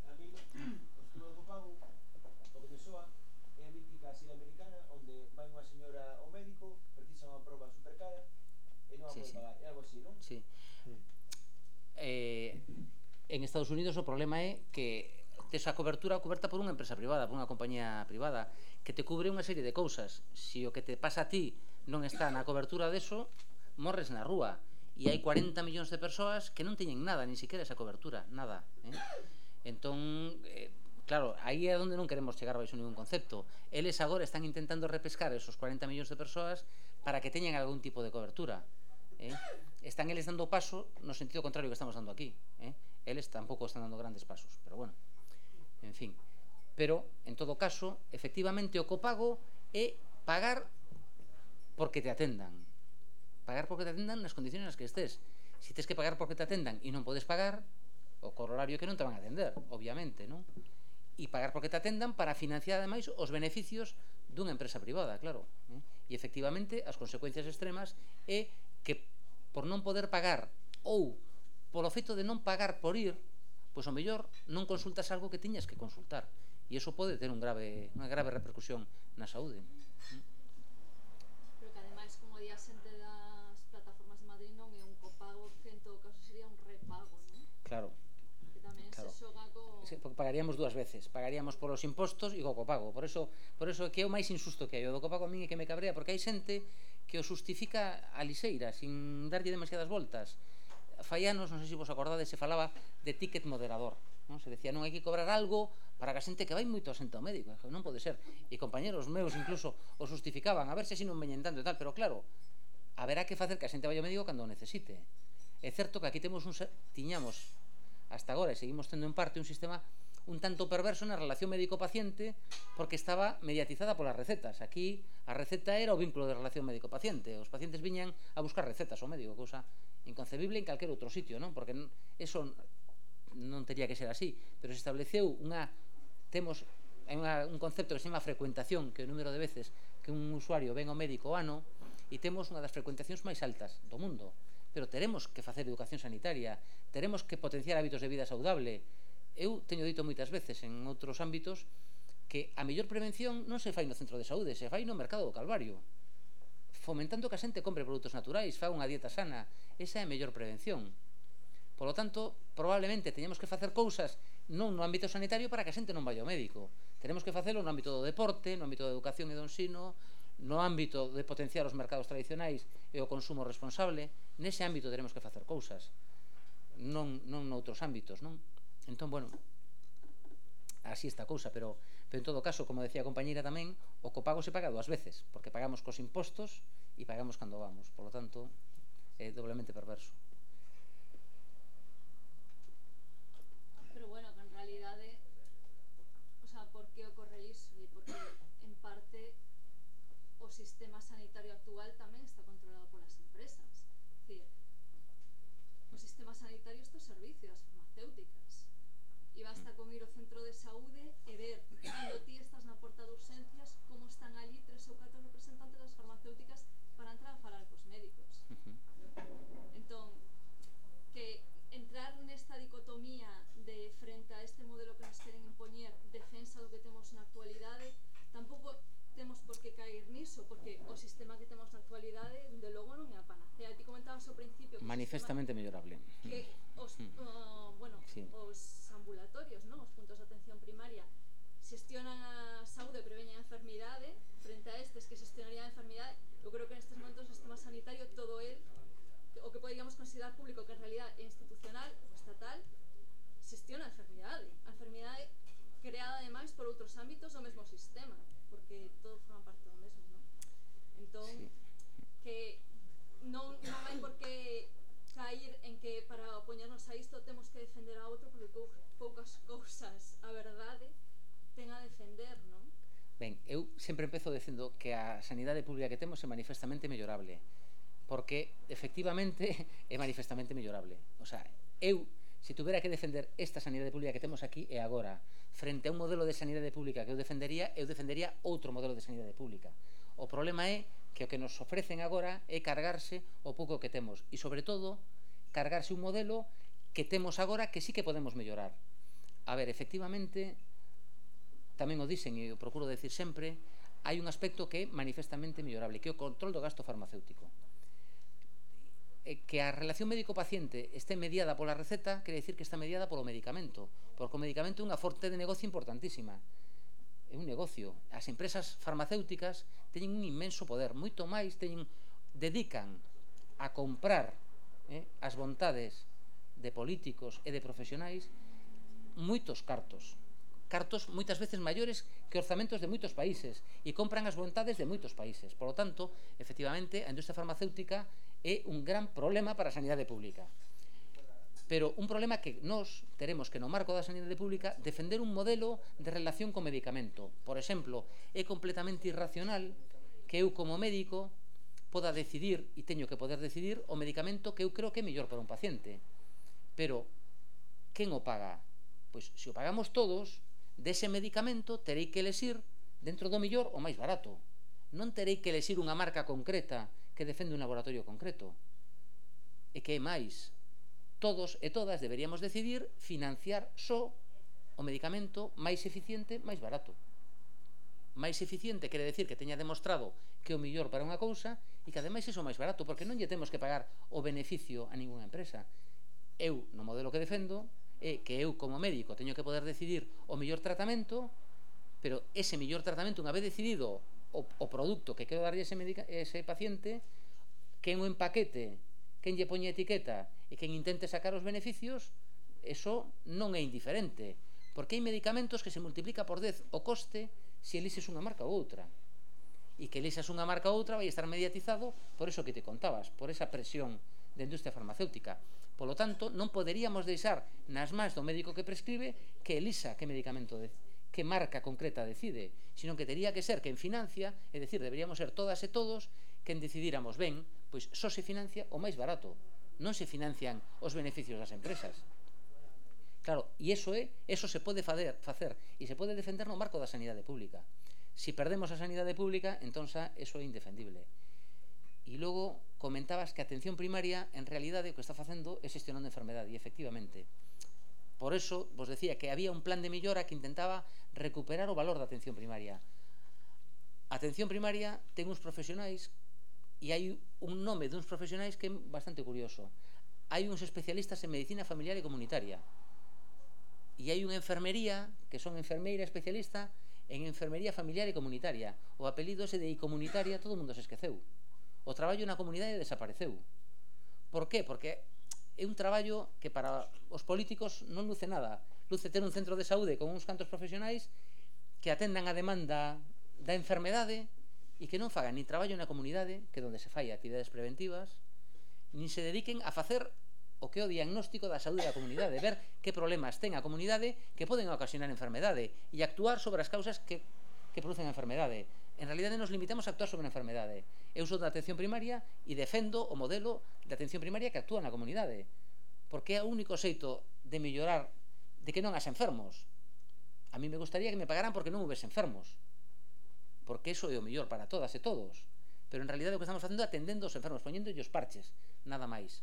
A mí, o estudo do copago, o que me soa é a mítica sila americana onde vai unha señora ao médico, precisa unha proba supercara e non a Sí, pode sí. pagar, é algo así, non? Sí. Eh, en Estados Unidos o problema é que tes a cobertura coberta por unha empresa privada, por unha compañía privada, que te cubre unha serie de cousas. Se o que te pasa a ti non está na cobertura deso, morres na rúa. E hai cuarenta millóns de persoas que non teñen nada, ni siquiera esa cobertura, nada. Eh? Entón, eh, claro, aí é onde non queremos chegar baixo ningún concepto. Eles agora están intentando repescar esos cuarenta millóns de persoas para que teñan algún tipo de cobertura. Eh? Están eles dando paso no sentido contrario que estamos dando aquí. Eh? Eles tampouco están dando grandes pasos, pero bueno, en fin. Pero, en todo caso, efectivamente o copago é pagar porque te atendan. Pagar porque te atendan nas condiciones nas que estés. Se tes que pagar porque te atendan e non podes pagar, o corolario que non te van a atender, obviamente, non? E pagar porque te atendan para financiar, ademais, os beneficios dunha empresa privada, claro. Eh? E, efectivamente, as consecuencias extremas é que por non poder pagar ou polo feito de non pagar por ir, pois ao mellor non consultas algo que tiñas que consultar. E iso pode ter un grave, unha grave repercusión na saúde. Pero que ademais, como di a xente das plataformas de Madrid, non é un copago, que en todo caso sería un repago, non? Claro. Que tamén Claro. se xoga co... Sí, porque pagaríamos dúas veces, pagaríamos polos impostos e co copago. Por eso, por eso é que é o máis injusto que hai. O do copago a min é que me cabrea, porque hai xente que o justifica a lixeira, sin darlle demasiadas voltas. Fai anos, non sei se vos acordades, se falaba de ticket moderador, non? Se decía, non hai que cobrar algo para que a xente que vai moito a xente ao médico. Non pode ser. E compañeros meus incluso o justificaban, a ver se así non veñen tanto e tal, pero claro, haberá que facer que a xente vai ao médico cando o necesite. É certo que aquí temos un tiñamos hasta agora e seguimos tendo en parte un sistema un tanto perverso na relación médico-paciente, porque estaba mediatizada polas recetas. Aquí a receta era o vínculo de relación médico-paciente. Os pacientes viñan a buscar recetas ao médico, cousa inconcebible en calquer outro sitio, non? Porque eso non teria que ser así, pero se estableceu unha temos hai unha, un concepto que se chama frecuentación, que é o número de veces que un usuario ven ao médico ao ano, e temos unha das frecuentacións máis altas do mundo. Pero teremos que facer educación sanitaria, teremos que potenciar hábitos de vida saudable. Eu teño dito moitas veces en outros ámbitos que a mellor prevención non se fai no centro de saúde, se fai no mercado do Calvario, fomentando que a xente compre produtos naturais, faga unha dieta sana. Esa é a mellor prevención. Por lo tanto, probablemente teñamos que facer cousas non no ámbito sanitario para que a xente non vai ao médico. Tenemos que facelo no ámbito do deporte, no ámbito da educación e do ensino, no ámbito de potenciar os mercados tradicionais e o consumo responsable. Nese ámbito teremos que facer cousas, non, non noutros ámbitos, non? Entón, bueno, así está a cousa, pero, pero en todo caso, como decía a compañeira tamén, o copago se paga dúas veces, porque pagamos cos impostos e pagamos cando vamos, por lo tanto, é doblemente perverso. Pero sistema sanitario actual tamén está controlado polas empresas. É dicir, o sistema sanitario estos servicios, as farmacéuticas. E basta con ir ao centro de saúde e ver, cando ti estás na porta de urxencias, como están ali tres ou catro representantes das farmacéuticas para entrar a falar cos médicos. Uh-huh. Entón, que entrar nesta dicotomía de frente a este modelo que nos queren impoñer, defensa do que temos na actualidade, tampouco temos por que caer niso, porque o sistema que temos na actualidade, de logo, non é a panacea. Ti comentabas ao principio que manifestamente mellorable. Que os, uh, bueno, sí. os ambulatorios, non? Os puntos de atención primaria xestionan a saúde e preveñen a enfermidade, frente a estes que xestionarían a enfermidade. Eu creo que nestes momentos o sistema sanitario, todo el, o que poderíamos considerar público, que en realidad é institucional ou estatal, xestiona a enfermidade. A enfermidade creada ademais por outros ámbitos do mesmo sistema, porque todos forman parte do mesmo, non? Entón, sí. que non, non hai por que cair en que para opoñernos a isto temos que defender a outro, porque poucas cousas a verdade ten a defender, non? Ben, eu sempre empezo dicindo que a sanidade pública que temos é manifestamente mellorable, porque efectivamente é manifestamente mellorable. O sea, eu, se tuvera que defender esta sanidade pública que temos aquí e agora, frente a un modelo de sanidade pública que eu defendería, eu defendería outro modelo de sanidade pública. O problema é que o que nos ofrecen agora é cargarse o pouco que temos e, sobre todo, cargarse un modelo que temos agora que sí que podemos mellorar. A ver, efectivamente, tamén o dicen e o procuro decir sempre, hai un aspecto que é manifestamente mellorable, que é o control do gasto farmacéutico. Que a relación médico-paciente este mediada pola receta quere dicir que está mediada polo medicamento, porque o medicamento é unha forte de negocio importantísima. É un negocio. As empresas farmacéuticas teñen un inmenso poder, moito máis teñen, dedican a comprar eh, as vontades de políticos e de profesionais moitos cartos. Cartos moitas veces maiores que orzamentos de moitos países e compran as vontades de moitos países. Por lo tanto, efectivamente, a industria farmacéutica é un gran problema para a sanidade pública. Pero un problema que nós teremos que no marco da sanidade pública defender un modelo de relación co medicamento. Por exemplo, é completamente irracional que eu como médico poda decidir, e teño que poder decidir, o medicamento que eu creo que é mellor para un paciente. Pero, quen o paga? Pois, se o pagamos todos, dese medicamento terei que elexir dentro do mellor o máis barato. Non terei que elexir unha marca concreta que defende un laboratorio concreto. E que é máis, todos e todas deberíamos decidir financiar só o medicamento máis eficiente, máis barato. Máis eficiente quere decir que teña demostrado que é o mellor para unha cousa e que ademais é o máis barato, porque non lle temos que pagar o beneficio a ninguna empresa. Eu, no modelo que defendo, é que eu como médico teño que poder decidir o mellor tratamento, pero ese mellor tratamento, unha vez decidido o, o produto que quero darlle ese, medica, ese paciente, quen o empaquete, quen lle poñe etiqueta e quen intente sacar os beneficios, eso non é indiferente, porque hai medicamentos que se multiplica por dez o coste se elixes unha marca ou outra, e que elixas unha marca ou outra vai estar mediatizado por eso que te contabas, por esa presión da industria farmacéutica. Por lo tanto, non poderíamos deixar nas mans do médico que prescribe que elixa que medicamento, de, que marca concreta decide, sino que tería que ser quen financia, é dicir, deberíamos ser todas e todos quen decidíramos, ben, pois só se financia o máis barato, non se financian os beneficios das empresas. Claro, e iso é, eso se pode facer, facer e se pode defender no marco da sanidade pública. Si perdemos a sanidade pública, entón xa eso é indefendible. E logo comentabas que a atención primaria en realidade o que está facendo é xestionando a enfermedade, e efectivamente. Por eso vos decía que había un plan de mellora que intentaba recuperar o valor da atención primaria. A atención primaria ten uns profesionais e hai un nome duns profesionais que é bastante curioso. Hai uns especialistas en medicina familiar e comunitaria e hai unha enfermería que son enfermeira especialista en enfermería familiar e comunitaria. O apelido ese de comunitaria todo o mundo se esqueceu. O traballo na comunidade desapareceu. Por qué? Porque é un traballo que para os políticos non luce nada. Luce ter un centro de saúde con uns cantos profesionais que atendan a demanda da enfermedade e que non fagan ni traballo na comunidade, que é onde se fai actividades preventivas, nin se dediquen a facer o que é o diagnóstico da saúde da comunidade, ver que problemas ten a comunidade que poden ocasionar enfermedade e actuar sobre as causas que, que producen a enfermedade. en realidade nos limitamos a actuar sobre a enfermedade. Eu sou da atención primaria e defendo o modelo de atención primaria que actúa na comunidade, porque é o único xeito de mellorar, de que non has enfermos. A mí me gustaría que me pagaran porque non houvese enfermos, porque iso é o mellor para todas e todos, pero en realidade o que estamos facendo é atendendo os enfermos, poñendo os parches, nada máis.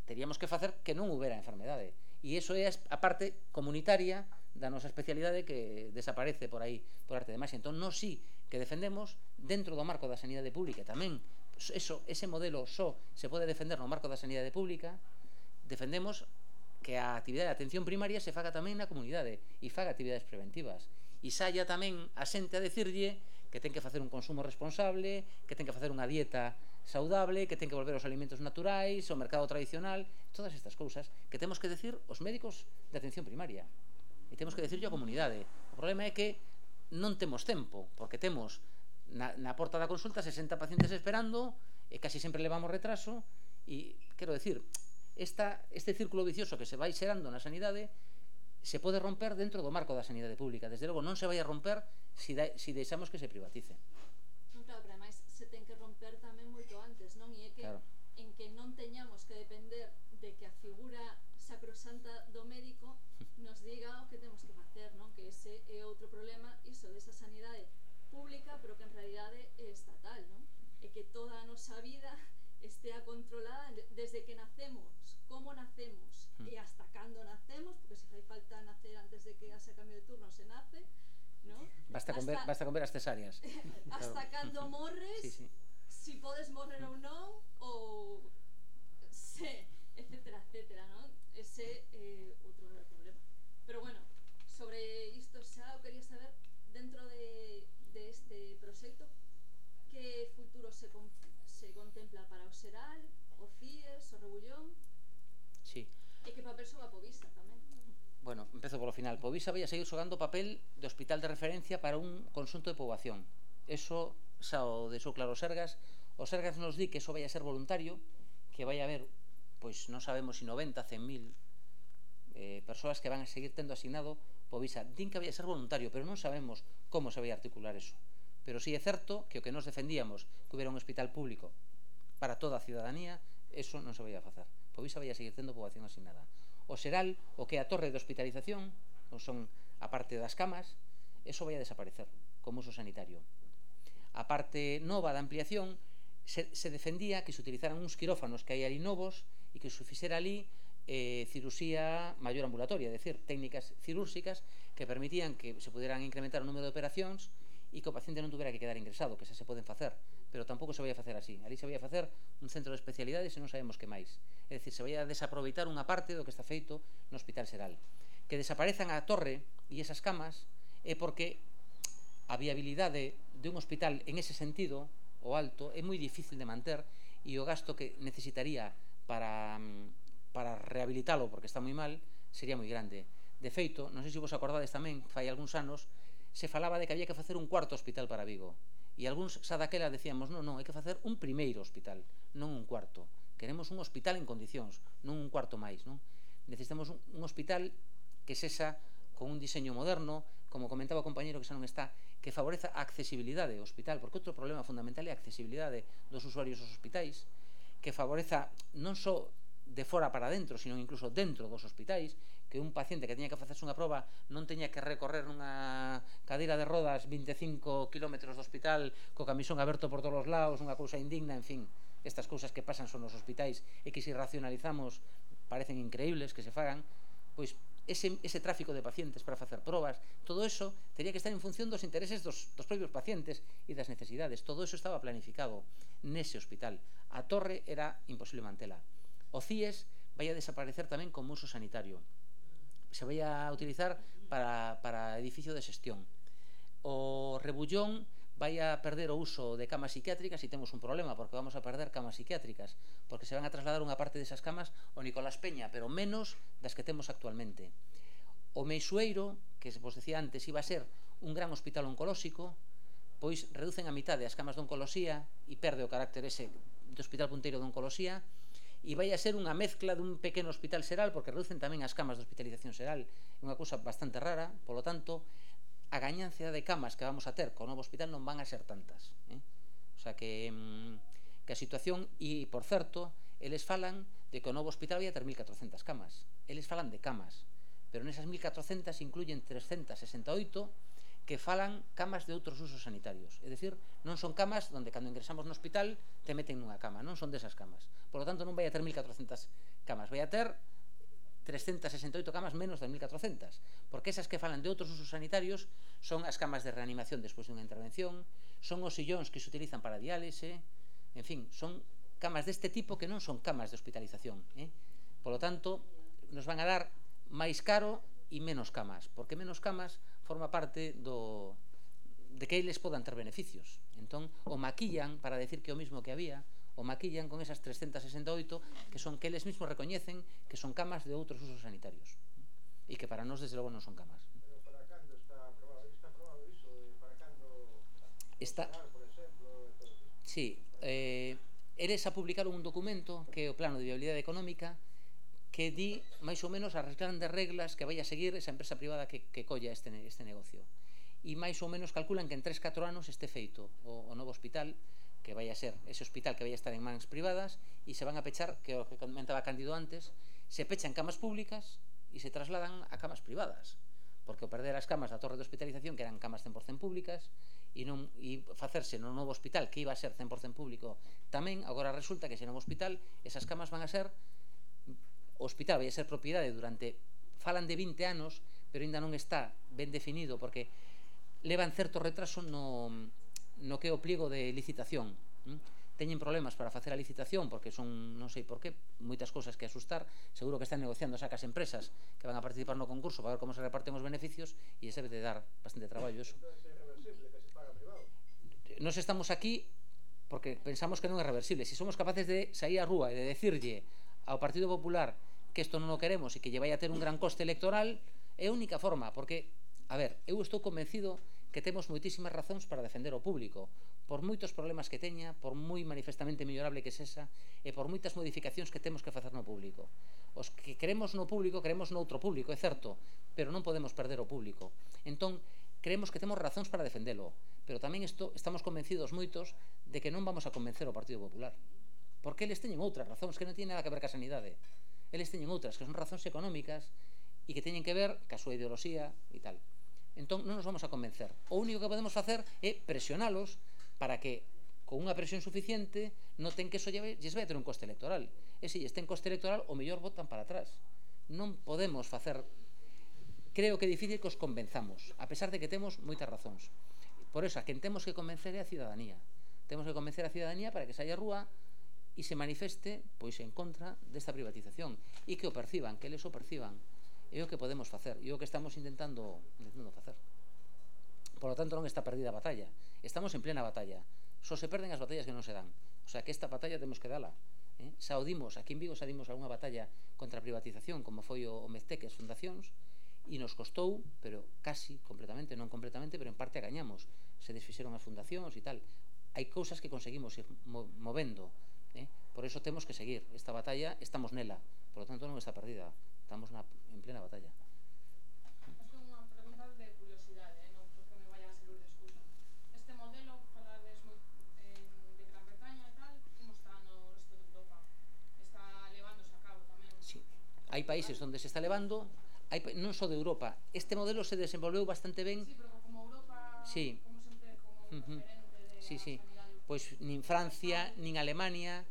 Teríamos que facer que non houbera enfermedade, e iso é a parte comunitaria da nosa especialidade que desaparece por aí, por arte de magia. Entón, nós sí que defendemos dentro do marco da sanidade pública, tamén eso, ese modelo só se pode defender no marco da sanidade pública. Defendemos que a actividade de atención primaria se faga tamén na comunidade e faga actividades preventivas, e saia tamén a xente a decirlle que ten que facer un consumo responsable, que ten que facer unha dieta saudable, que ten que volver aos alimentos naturais, ao mercado tradicional, todas estas cousas que temos que decir os médicos de atención primaria e temos que decirlo á comunidade. O problema é que non temos tempo, porque temos na, na porta da consulta sesenta pacientes esperando e casi sempre levamos retraso e, quero decir, esta, este círculo vicioso que se vai xerando na sanidade se pode romper dentro do marco da sanidade pública. Desde logo non se vai a romper se, da, se deixamos que se privatice. Non, claro, pero ademais se ten que romper tamén moito antes, non? E é que Claro. en que non teñamos que depender de que a figura sacrosanta do médico nos diga o que temos que facer, non? Que ese é outro problema, iso desa sanidade pública, pero que en realidade é estatal, non? E que toda a nosa vida estea controlada desde que nacemos, como nacemos e hasta cando nacemos, porque se fai falta nacer antes de que haxa cambio de turno se nace, non? Basta con ver, Hasta- basta con ver as cesáreas. hasta cando morres, Sí, sí. si podes morrer ou non, ou se, etcétera, etcétera, non? Ese é eh, outro grave problema. Pero bueno, sobre isto xa eu quería saber, dentro de, de este proxecto, que futuro se, con, se contempla para o Seral, o CIES, o Rebullón, Sí. e que papel xoga a Povisa tamén. Bueno, empezo polo final. Povisa vai a seguir xogando papel de hospital de referencia para un conxunto de poboación. Eso xa o deixou claro o Sergas. O Sergas nos di que eso vai a ser voluntario, que vai a haber, pois non sabemos se noventa, cen mil eh, persoas que van a seguir tendo asignado Povisa. Din que vai a ser voluntario, pero non sabemos como se vai a articular eso. Pero sí é certo que o que nos defendíamos, que hubiera un hospital público para toda a ciudadanía, eso non se vai a facer. Povisa vai a seguir tendo poboación asignada. O Seral, o que é a torre de hospitalización, non son a parte das camas, eso vai a desaparecer como uso sanitario. A parte nova da ampliación, se, se defendía que se utilizaran uns quirófanos que hai ali novos e que se fixera ali eh, cirusía maior ambulatoria, é dicir, técnicas cirúrxicas que permitían que se pudieran incrementar o número de operacións e que o paciente non tuvera que quedar ingresado, que xa se poden facer, pero tampouco se vai a facer así. Ali se vai a facer un centro de especialidades e non sabemos que máis. É dicir, se vai a desaproveitar unha parte do que está feito no Hospital Seral. Que desaparezan a torre e esas camas é porque a viabilidade de un hospital en ese sentido, o alto, é moi difícil de manter e o gasto que necesitaría para, para rehabilitalo, porque está moi mal, sería moi grande. De feito, non sei se vos acordades tamén, fai algúns anos, se falaba de que había que facer un cuarto hospital para Vigo. E algúns xa daquela decíamos, non, non, hai que facer un primeiro hospital, non un cuarto. Queremos un hospital en condicións, non un cuarto máis, non? Necesitamos un, un hospital que sexa con un diseño moderno, como comentaba o compañero que xa non está, que favoreza a accesibilidade ao hospital, porque outro problema fundamental é a accesibilidade dos usuarios aos hospitais, que favoreza non só de fora para dentro, sino incluso dentro dos hospitais, que un paciente que teña que facerse unha proba non teña que recorrer nunha cadeira de rodas vinte e cinco kilómetros do hospital co camisón aberto por todos os lados, unha cousa indigna, en fin, estas cousas que pasan son nos hospitais e que se racionalizamos parecen increíbles que se fagan, pois ese, ese tráfico de pacientes para facer probas, todo eso teria que estar en función dos intereses dos, dos propios pacientes e das necesidades. Todo eso estaba planificado nese hospital. A torre era imposible mantela. O CIES vai a desaparecer tamén como uso sanitario. Se vai a utilizar para, para edificio de xestión. O Rebullón vai a perder o uso de camas psiquiátricas e temos un problema, porque vamos a perder camas psiquiátricas, porque se van a trasladar unha parte desas camas ao Nicolás Peña, pero menos das que temos actualmente. O Meixueiro, que vos decía antes, iba a ser un gran hospital oncolóxico, pois reducen a mitad as camas de oncoloxía e perde o carácter ese de hospital punteiro de oncoloxía, e vai a ser unha mezcla dun pequeno hospital xeral, porque reducen tamén as camas de hospitalización xeral, é unha cousa bastante rara. Polo tanto, a gañancia de camas que vamos a ter co novo hospital non van a ser tantas, eh? O sea que, que a situación, e por certo, eles falan de que o novo hospital vai a ter mil catrocentas camas. Eles falan de camas, pero nesas mil catrocentas incluyen trescentas sesenta e oito que falan camas de outros usos sanitarios. É dicir, non son camas onde cando ingresamos no hospital te meten nunha cama, non son desas camas. Por lo tanto, non vai a ter mil catrocentas camas, vai a ter trescentas sesenta e oito camas menos de mil catrocentas, porque esas que falan de outros usos sanitarios son as camas de reanimación despois de unha intervención, son os sillóns que se utilizan para diálise, en fin, son camas deste tipo que non son camas de hospitalización, eh? Por lo tanto, nos van a dar máis caro e menos camas, porque menos camas forma parte do de que eles podan ter beneficios. Entón, o maquillan para decir que o mismo que había, o maquillan con esas trescentas sesenta e oito que son que eles mesmos recoñecen que son camas de outros usos sanitarios e que para nós desde logo non son camas. Pero para cando está aprobado? Está aprobado iso? Para cando está, por exemplo, e todo iso? Sí, eh, eles a publicaron un documento que é o plano de viabilidade económica que di máis ou menos as grandes reglas que vai a seguir esa empresa privada que, que colla este, este negocio, e máis ou menos calculan que en tres catro anos este feito o, o novo hospital, que vai a ser ese hospital que vai a estar en mans privadas, e se van a pechar, que o que comentaba Cándido antes, se pechan camas públicas e se trasladan a camas privadas, porque o perder as camas da torre de hospitalización, que eran camas cen por cento públicas, e, non, e facerse no novo hospital que iba a ser cen por cento público tamén, agora resulta que ese novo hospital, esas camas van a ser, o hospital vai a ser propiedade durante, falan de vinte anos, pero ainda non está ben definido, porque levan certo retraso no, no que é o pliego de licitación. ¿Mm? Teñen problemas para facer a licitación, porque son, non sei por qué, moitas cousas que asustar. Seguro que están negociando sacas empresas que van a participar no concurso para ver como se reparten os beneficios, e ese debe de dar bastante traballo eso. Nos estamos aquí porque pensamos que non é reversible. Se somos capaces de sair á rúa e de decirlle ao Partido Popular que isto non o queremos e que lle vai a ter un gran coste electoral, é a única forma, porque, a ver, eu estou convencido que temos moitísimas razóns para defender o público, por moitos problemas que teña, por moi manifestamente mellorable que sexa, e por moitas modificacións que temos que facer no público. Os que queremos no público, queremos noutro público, é certo, pero non podemos perder o público. Entón, creemos que temos razóns para defendelo, pero tamén isto, estamos convencidos moitos de que non vamos a convencer o Partido Popular, porque eles teñen outras razóns que non teñen nada que ver ca sanidade. Eles teñen outras que son razóns económicas e que teñen que ver ca súa ideoloxía e tal. Entón non nos vamos a convencer. O único que podemos facer é presionalos para que con unha presión suficiente noten que eso lles vai a ter un coste electoral. E se lles ten coste electoral, o mellor votan para atrás. Non podemos facer, creo que é difícil que os convenzamos, a pesar de que temos moitas razóns. Por eso, a quen temos que convencer é a ciudadanía. Temos que convencer a ciudadanía para que saia á rúa e se manifeste pois en contra desta privatización e que o perciban, que eles o perciban. É o que podemos facer, e o que estamos intentando, intentando facer. Por lo tanto, non está perdida a batalla. Estamos en plena batalla. Só se perden as batallas que non se dan. O sea, que esta batalla temos que dala. Eh? Xa o dimos, aquí en Vigo xa dimos algunha batalla contra a privatización, como foi o Meztec e as fundacións, e nos costou, pero casi completamente, non completamente, pero en parte a gañamos. Se desfixeron as fundacións e tal. Hai cousas que conseguimos ir movendo. Eh? Por eso temos que seguir esta batalla, estamos nela. Por lo tanto, non está perdida. Estamos na, en plena batalla. Esta é unha pregunta de curiosidade, eh? Non porque me vaya a servir de excusa. Este modelo, falades moi, eh, de Gran Bretaña e tal, como está no resto de Europa? Está levándose a cabo tamén? Sí, hai países onde se está levando, hai, non só de Europa. Este modelo se desenvolveu bastante ben. Sí, pero como Europa, sí. como sempre, como un uh -huh. referente de sí, sí. sanidade. Pois nin Francia, nin Alemania,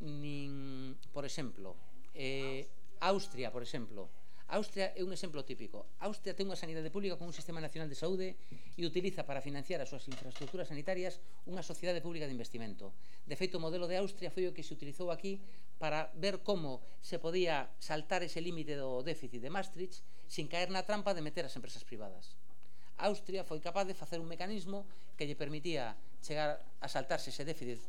nin, por exemplo, eh, Austria, por exemplo. Austria é un exemplo típico. Austria ten unha sanidade pública con un sistema nacional de saúde e utiliza para financiar as súas infraestructuras sanitarias unha sociedade pública de investimento. De feito, o modelo de Austria foi o que se utilizou aquí para ver como se podía saltar ese límite do déficit de Maastricht sin caer na trampa de meter as empresas privadas. Austria foi capaz de facer un mecanismo que lle permitía chegar a saltarse ese déficit,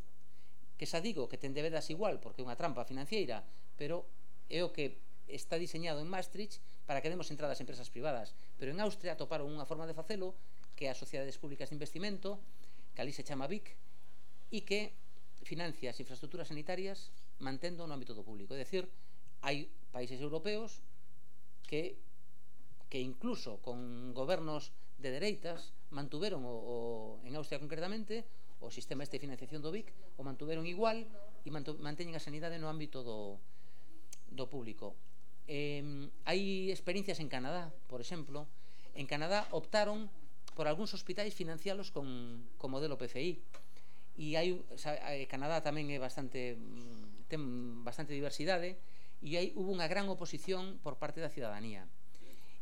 que xa digo que ten debedas igual porque é unha trampa financiera, pero é o que está diseñado en Maastricht para que demos entradas a empresas privadas. Pero en Austria atoparon unha forma de facelo, que é as sociedades públicas de investimento, que ali se chama B I C, e que financia as infraestructuras sanitarias mantendo no ámbito do público. É dicir, hai países europeos que, que incluso con gobernos de dereitas mantuveron o, o, en Austria concretamente o sistema este de financiación do B I C o mantuveron igual e mantu, manteñen a sanidade no ámbito do, do público. Eh, hai experiencias en Canadá, por exemplo. En Canadá optaron por algúns hospitais financialos con, con modelo P F I. E hai, Canadá tamén é bastante, ten bastante diversidade, e aí hubo unha gran oposición por parte da cidadanía.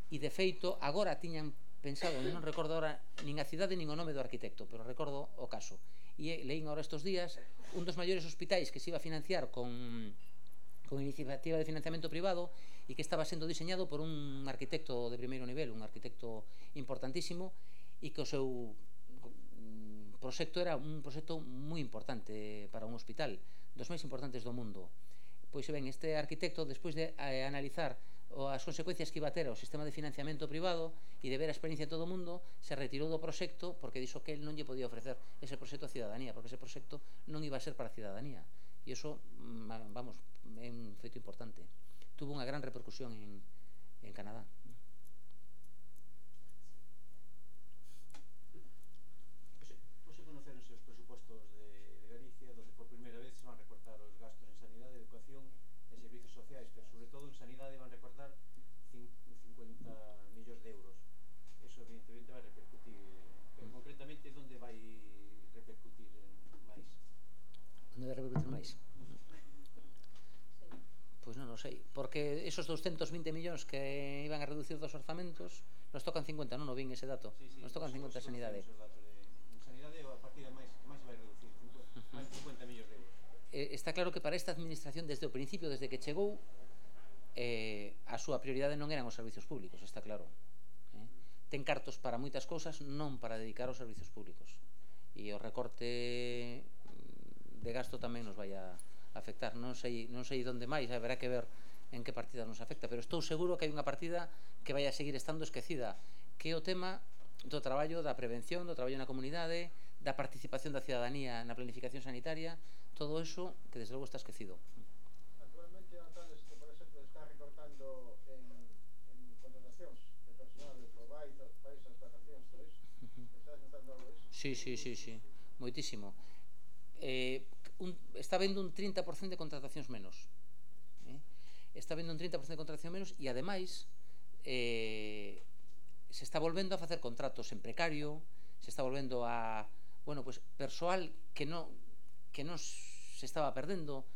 E de feito, agora tiñan pensado, non recordo agora nin a cidade nin o nome do arquitecto, pero recordo o caso. E leín agora estes días un dos maiores hospitais que se iba a financiar con con iniciativa de financiamento privado e que estaba sendo diseñado por un arquitecto de primeiro nivel, un arquitecto importantísimo, e que o seu proxecto era un proxecto moi importante para un hospital, dos máis importantes do mundo. Pois ben, este arquitecto, despois de eh, analizar as consecuencias que iba a ter o sistema de financiamento privado e de ver a experiencia de todo o mundo, se retirou do proxecto porque dixo que el non lle podía ofrecer ese proxecto á cidadanía, porque ese proxecto non iba a ser para a cidadanía. E iso, vamos, é un feito importante. Tuvo unha gran repercusión en, en Canadá. Hoxe conoceronse os presupostos de, de Galicia, donde por primeira vez se van recortar os gastos en sanidade, educación e servicios sociais, pero sobre todo en sanidade van recortar cincuenta millóns de euros. Eso evidentemente vai repercutir, pero concretamente onde vai repercutir máis? Onde vai repercutir máis? Pois non o sei, porque esos doscientos vinte millóns que iban a reducir dos orzamentos nos tocan cincuenta, non o vin ese dato, sí, sí, nos tocan cincuenta a sanidade. En sanidade a partida máis máis vai reducir, máis cincuenta millóns de euros. Eh, está claro que para esta administración desde o principio, desde que chegou, eh, a súa prioridade non eran os servicios públicos, está claro. Eh? Ten cartos para moitas cousas, non para dedicar aos servicios públicos. E o recorte de gasto tamén nos vai a afectar. Non sei, non sei onde máis, haberá que ver en que partida nos afecta, pero estou seguro que hai unha partida que vai a seguir estando esquecida, que é o tema do traballo da prevención, do traballo na comunidade, da participación da cidadanía na planificación sanitaria, todo eso que desde logo está esquecido. Actualmente notades que, por exemplo, está recortando en, en contratacións de personal, de provider, baixas vacacións, todo iso. Estás notando algo disso? Sí, sí, sí, sí, moitísimo. Eh, un, está vendo un trinta por cento de contratacións menos. Eh? Está vendo un trinta por cento de contratacións menos e, ademais, eh, se está volvendo a facer contratos en precario, se está volvendo a, bueno, pues, persoal que non que non se estaba perdendo.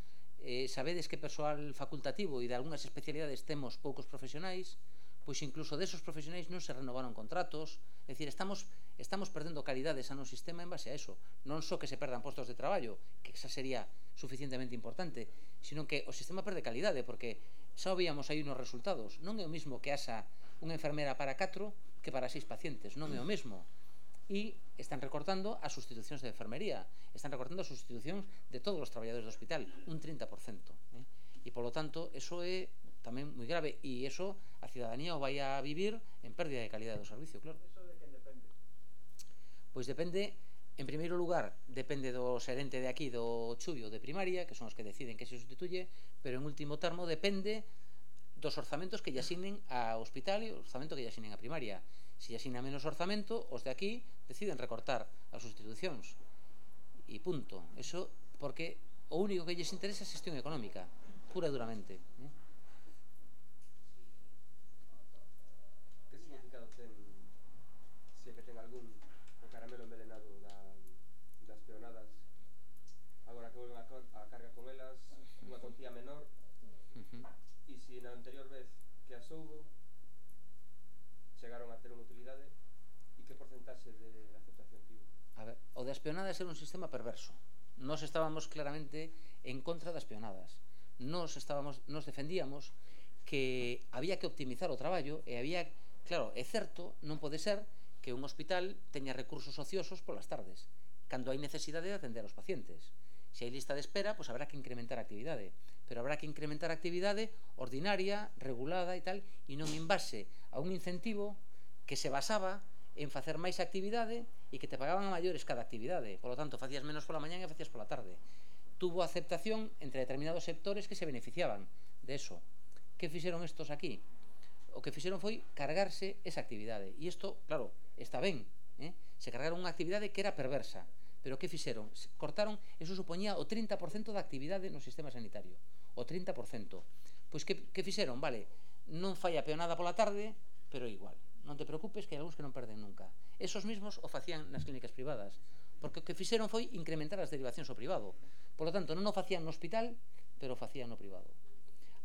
Eh, sabedes que persoal facultativo e de algunhas especialidades temos poucos profesionais, pois incluso desos profesionais non se renovaron contratos. É dicir, estamos, estamos perdendo calidade xa no sistema en base a eso. Non só que se perdan postos de traballo, que esa sería suficientemente importante, sino que o sistema perde calidade, porque xa o víamos aí nos resultados. Non é o mismo que haxa unha enfermera para catro que para seis pacientes, non é o mesmo. E están recortando as sustitucións de enfermería, están recortando as sustitucións de todos os traballadores do hospital, un trinta por cento. Eh? E, polo tanto, eso é tamén moi grave, e eso a cidadanía o vai a vivir en pérdida de calidade do servicio, claro. Eso de quen depende? Pois depende, en primeiro lugar, depende do xerente de aquí do Chubio de primaria, que son os que deciden que se sustituye, pero en último termo depende dos orzamentos que lle asignen ao hospital e o orzamento que lle asignen a primaria. Se lle asigna menos orzamento, os de aquí deciden recortar as sustitucións. E punto. Eso porque o único que lles interesa é a xestión económica, pura e duramente. Eh? Que significado ten, se que ten algún, o caramelo envenenado da, das peonadas, agora que volven a, a carga con elas, unha contía menor, Uh-huh. e se na anterior vez que as houbo chegaron a ter unha utilidade, e que porcentaxe de aceptación tivo? A ver, o das peonadas era un sistema perverso. Nos estábamos claramente en contra das peonadas. Nos estábamos, nos defendíamos que había que optimizar o traballo e había, claro, é certo, non pode ser que un hospital teña recursos ociosos polas tardes, cando hai necesidade de atender aos pacientes. Se hai lista de espera, pois habrá que incrementar a actividade, pero habrá que incrementar a actividade ordinaria, regulada e tal, e non en base a un incentivo que se basaba en facer máis actividade e que te pagaban a maiores cada actividade. Por lo tanto, facías menos pola mañá e facías pola tarde. Tuvo aceptación entre determinados sectores que se beneficiaban de eso. Que fixeron estos aquí? O que fixeron foi cargarse esa actividade. E isto, claro, está ben, eh? Se cargaron unha actividade que era perversa, pero que fixeron? Cortaron, eso supoñía o trinta por cento da actividade no sistema sanitario, o trinta por cento. Pois que, que fixeron? Vale, non fai a peonada pola tarde, pero igual, non te preocupes que hai algúns que non perden nunca. Esos mismos o facían nas clínicas privadas, porque o que fixeron foi incrementar as derivacións ao privado. Por lo tanto, non o facían no hospital, pero o facían no privado.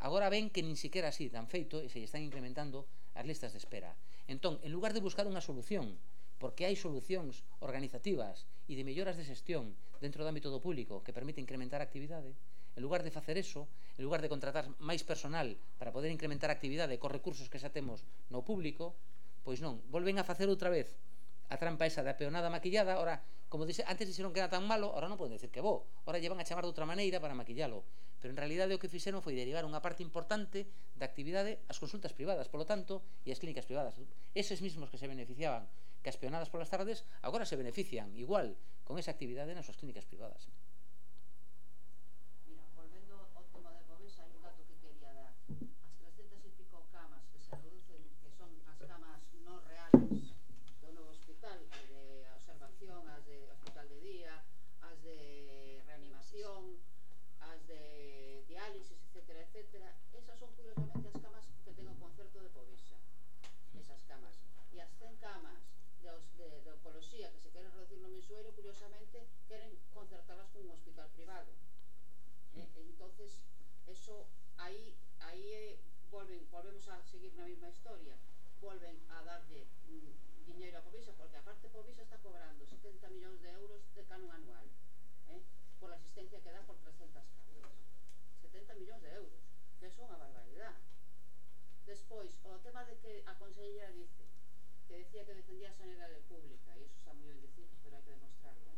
Agora ven que nin siquiera así dan feito e se están incrementando as listas de espera. Entón, en lugar de buscar unha solución, porque hai solucións organizativas e de melloras de xestión dentro do ámbito do público que permite incrementar a actividade, en lugar de facer eso, en lugar de contratar máis personal para poder incrementar a actividade cos recursos que xa temos no público, pois non, volven a facer outra vez a trampa esa da peonada maquillada. Ora, como dice, antes dixeron que era tan malo, ahora non poden decir que bo, ahora lle van a chamar de outra maneira para maquillalo, pero en realidade o que fixeron foi derivar unha parte importante da actividade ás consultas privadas, polo tanto, e as clínicas privadas. Eses mismos que se beneficiaban que as peonadas polas tardes, agora se benefician igual con esa actividade nas súas clínicas privadas. Mira, volvendo ao tema de Povesa, hai un dato que quería dar. As trescentas e pico camas que se reducen, que son as camas non reales do novo hospital, as de observación, as de hospital de día, as de reanimación, as de diálisis, etcétera, etcétera, esas son curiosamente as camas que ten o concerto de Povesa. Esas camas. E as cen camas de, de, de oncología que se queren reducir no mensueiro, curiosamente queren concertarlas con un hospital privado. Eh, entonces, eso aí aí eh, volven, volvemos a seguir na mesma historia, volven a darlle mm, diñeiro a Povesa, porque aparte Povesa está cobrando setenta millóns de euros de canon anual, eh, por a asistencia que dá por trescentas camas. setenta millóns de euros, que é unha barbaridade. Despois, o tema de que a consellera dice que decía que defendía a sanidade pública, e iso está moi ben dicir, pero hai que demostrarlo,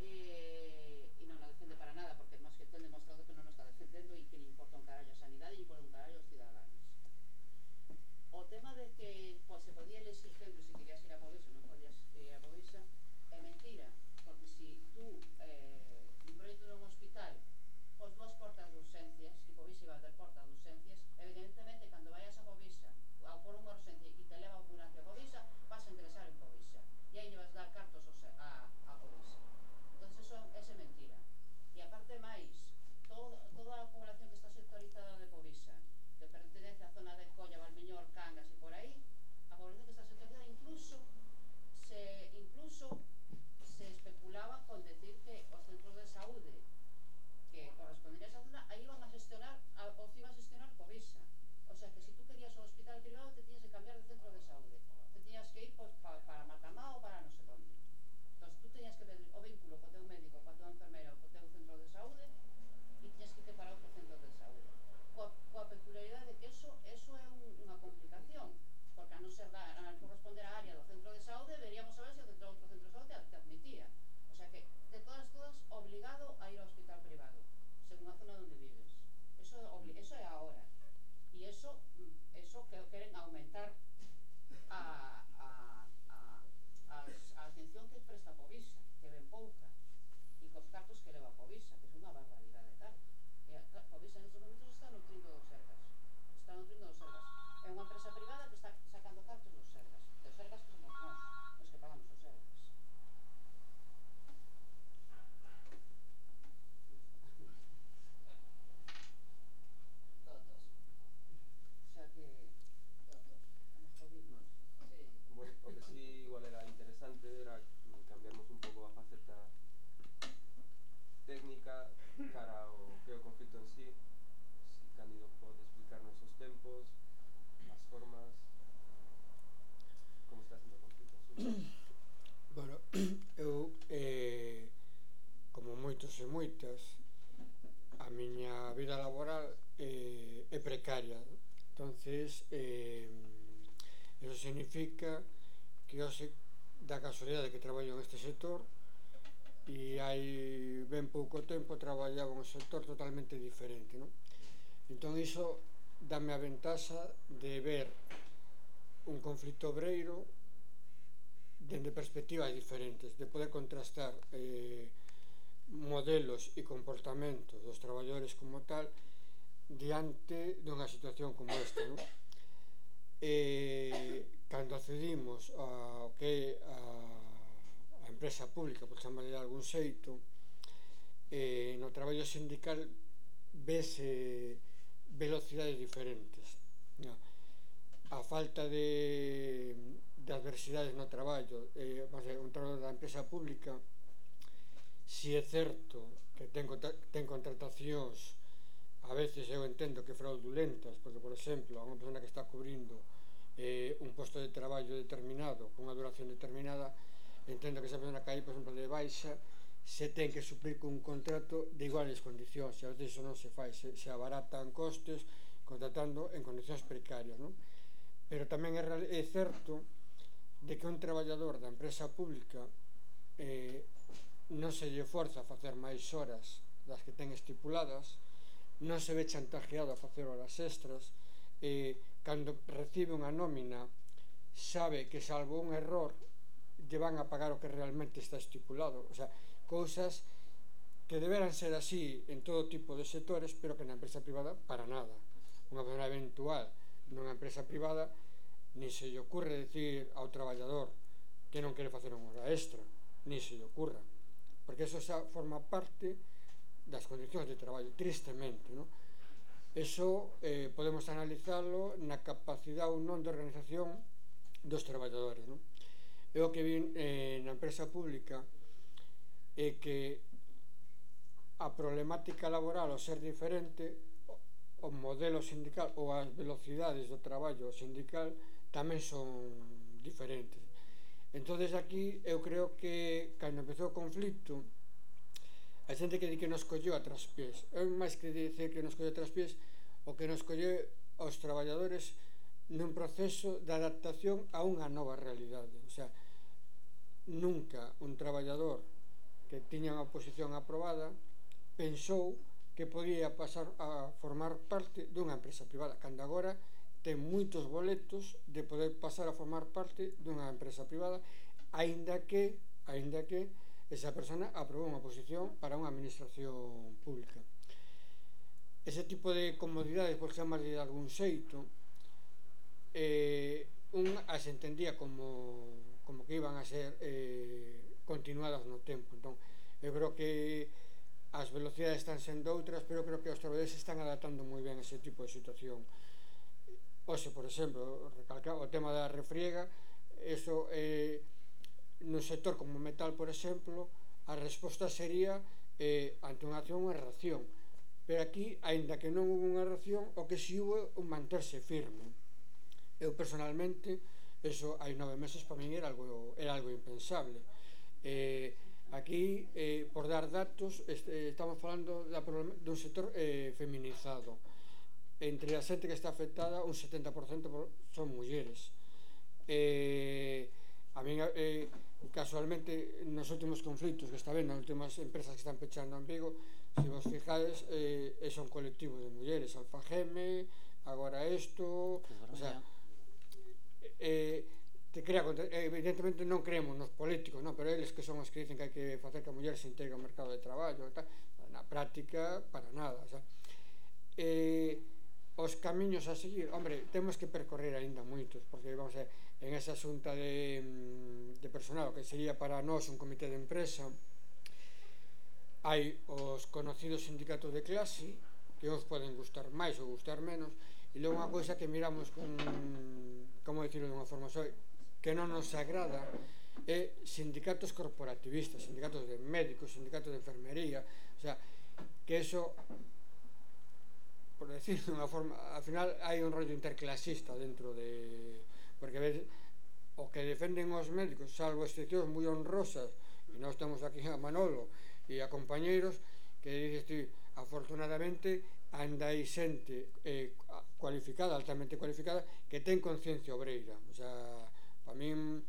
eh? e non a defende para nada, porque máis que ten demostrado que non o está defendendo e que lle importa un carallo a sanidade e lle importa un carallo aos ciudadanos. O tema de que pues, se podía elegir gente se querías ir a Povesa ou non podías ir a Povesa é mentira, porque se si tú eh, un proxecto dun hospital pos dúas portas de urgencias e Povesa iba a ter portas de urgencias, evidentemente cando vayas a Povesa ao por unha urgencia e te leva a ambulancia a Povesa, vas a interesar en Povesa e aí lle vas dar cartos a, a Povesa. Entón, eso é mentira. E aparte máis, todo, toda a población que está sectorizada de Povesa, que pertenece á zona de Colla, Valmiñor, Cangas e por aí, a población que está sectorizada incluso se, incluso se especulaba con decir que os centros de saúde que correspondería a esa zona, aí iban a gestionar, a, os iba a gestionar Povesa. O sea que se si tú querías un hospital privado te tiñas que cambiar de centro de saúde, te tiñas que ir pues, pa, para Matamá ou para non sei onde. Entón tú teñas que ver o vínculo co teu médico, coa tua enfermeira ou co teu centro de saúde e tiñas que ir para outro centro de saúde. Coa, coa peculiaridade de que eso, eso é un, unha complicación, porque a non ser da, a non corresponder á área do centro de saúde, veríamos a ver se o centro, outro centro de saúde te admitía. O sea que, de todas todas, obligado a ir ao hospital privado, según a zona onde vives. Eso, eso é ahora. E eso, eso que queren aumentar a, a, a, a, a atención que presta Povesa, que ven pouca, e cos cartos que leva Povesa, que é unha barbaridade tal. E a, Povesa en estes momentos está nutrindo dos Sergas. Está nutrindo dos Sergas. É unha empresa privada que está sacando cartos dos Sergas. Dos Sergas que somos nós, os que pagamos os Sergas. Bueno, o que sí igual era interesante era cambiarmos un pouco a faceta técnica cara ao que é o conflito en sí. Si Cándido pode explicarnos os tempos, as formas, como está sendo o conflito en sí. Bueno, eu, eh, como moitos e moitas, a miña vida laboral eh, é precaria. Entonces, eh, eso significa que eu se da casualidade que traballo neste sector e hai ben pouco tempo traballaba en un sector totalmente diferente, non? Entón iso dame a ventaxa de ver un conflito obreiro dende perspectivas diferentes, de poder contrastar eh, modelos e comportamentos dos traballadores como tal diante dunha situación como esta, non? Eh, cando accedimos ao que é a, a empresa pública, por chamarle de algún xeito, eh, no traballo sindical vese velocidades diferentes. No. A falta de, de adversidades no traballo, eh, un traballo da empresa pública, si é certo que ten, ten contratacións a veces eu entendo que fraudulentas, porque por exemplo a unha persona que está cubrindo eh, un posto de traballo determinado con unha duración determinada, entendo que esa persona que hai, por exemplo, de baixa, se ten que suplir con un contrato de iguales condicións, e a veces iso non se fai, se, se abaratan costes contratando en condicións precarias, non? Pero tamén é, é certo de que un traballador da empresa pública eh, non se lle forza a facer máis horas das que ten estipuladas, non se ve chantajeado a facer horas extras, eh, cando recibe unha nómina sabe que salvo un error lle van a pagar o que realmente está estipulado, o sea, cousas que deberan ser así en todo tipo de sectores, pero que na empresa privada para nada. Unha persona eventual nunha empresa privada ni se lle ocurre decir ao traballador que non quere facer unha hora extra, ni se lle ocurra, porque eso xa forma parte das condicións de traballo, tristemente, non? Eso eh, podemos analizarlo na capacidade ou non de organización dos traballadores, non? E o que vi eh, na empresa pública é que a problemática laboral ao ser diferente, o modelo sindical ou as velocidades do traballo sindical tamén son diferentes. Entonces aquí eu creo que cando empezou o conflito a xente que di que nos colleu a traspiés, é máis que dicer que nos colleu a traspiés, o que nos colleu aos traballadores nun proceso de adaptación a unha nova realidade. O sea, nunca un traballador que tiña unha posición aprobada pensou que podía pasar a formar parte dunha empresa privada, cando agora ten moitos boletos de poder pasar a formar parte dunha empresa privada, aínda que aínda que esa persona aprobou unha posición para unha administración pública. Ese tipo de comodidades, por chamarlle de algún xeito, eh, un as entendía como, como que iban a ser eh, continuadas no tempo. Entón, eu creo que as velocidades están sendo outras, pero creo que os traballadores están adaptando moi ben a ese tipo de situación. Oxe, por exemplo, recalcar o tema da refriega, eso eh, no sector como metal, por exemplo, a resposta sería eh, ante unha acción unha reacción, pero aquí, aínda que non hubo unha reacción, o que si hubo un manterse firme. Eu personalmente, eso hai nove meses para min era algo, era algo impensable. Eh, aquí, eh, por dar datos, este, estamos falando da, dun sector eh, feminizado. Entre a xente que está afectada, un setenta por cento son mulleres. Eh, a min, eh, casualmente, nos últimos conflitos que está vendo, nas últimas empresas que están pechando en Vigo, se vos fijades, eh, é un colectivo de mulleres, Alfageme, agora isto, o sea, eh, te crea, evidentemente non creemos nos políticos, no? Pero eles que son os que dicen que hai que facer que a muller se integre ao mercado de traballo, tal, na práctica, para nada, o sea, eh, os camiños a seguir, hombre, temos que percorrer aínda moitos, porque vamos a ver, en esa xunta de, de personal, que sería para nós un comité de empresa, hai os conocidos sindicatos de clase, que os poden gustar máis ou gustar menos, e logo unha cousa que miramos con, como dicirlo de unha forma soy, que non nos agrada, é sindicatos corporativistas, sindicatos de médicos, sindicatos de enfermería, o sea, que eso, por decir de unha forma, al final hai un rollo interclasista dentro de, porque ves, o que defenden os médicos, salvo excepcións moi honrosas, e nós temos aquí a Manolo e a compañeiros, que dices ti, afortunadamente anda aí xente eh, cualificada, altamente cualificada, que ten conciencia obreira. O sea, para min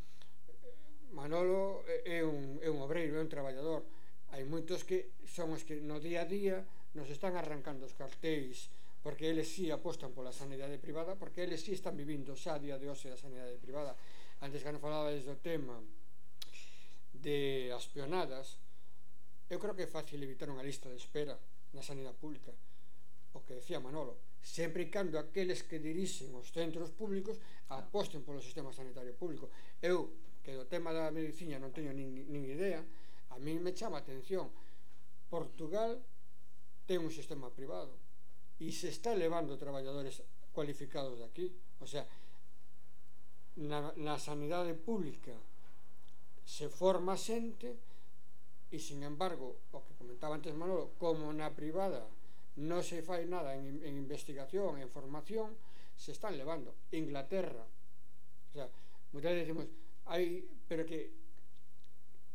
Manolo é un, é un obreiro, é un traballador. Hai moitos que son os que no día a día nos están arrancando os cartéis, porque eles sí apostan pola sanidade privada, porque eles sí están vivindo xa a día de hoxe da sanidade privada. Antes que non falabades do tema de as peonadas, eu creo que é fácil evitar unha lista de espera na sanidade pública. O que decía Manolo, sempre e cando aqueles que dirixen os centros públicos aposten polo sistema sanitario público. Eu, que do tema da medicina non teño nin, nin idea, a mí me chama a atención. Portugal ten un sistema privado e se está levando traballadores cualificados de aquí. O sea, na, na sanidade pública se forma xente e, sin embargo, o que comentaba antes Manolo, como na privada non se fai nada en, en investigación, en formación, se están levando. Inglaterra, o sea, muchas veces decimos, hai, pero que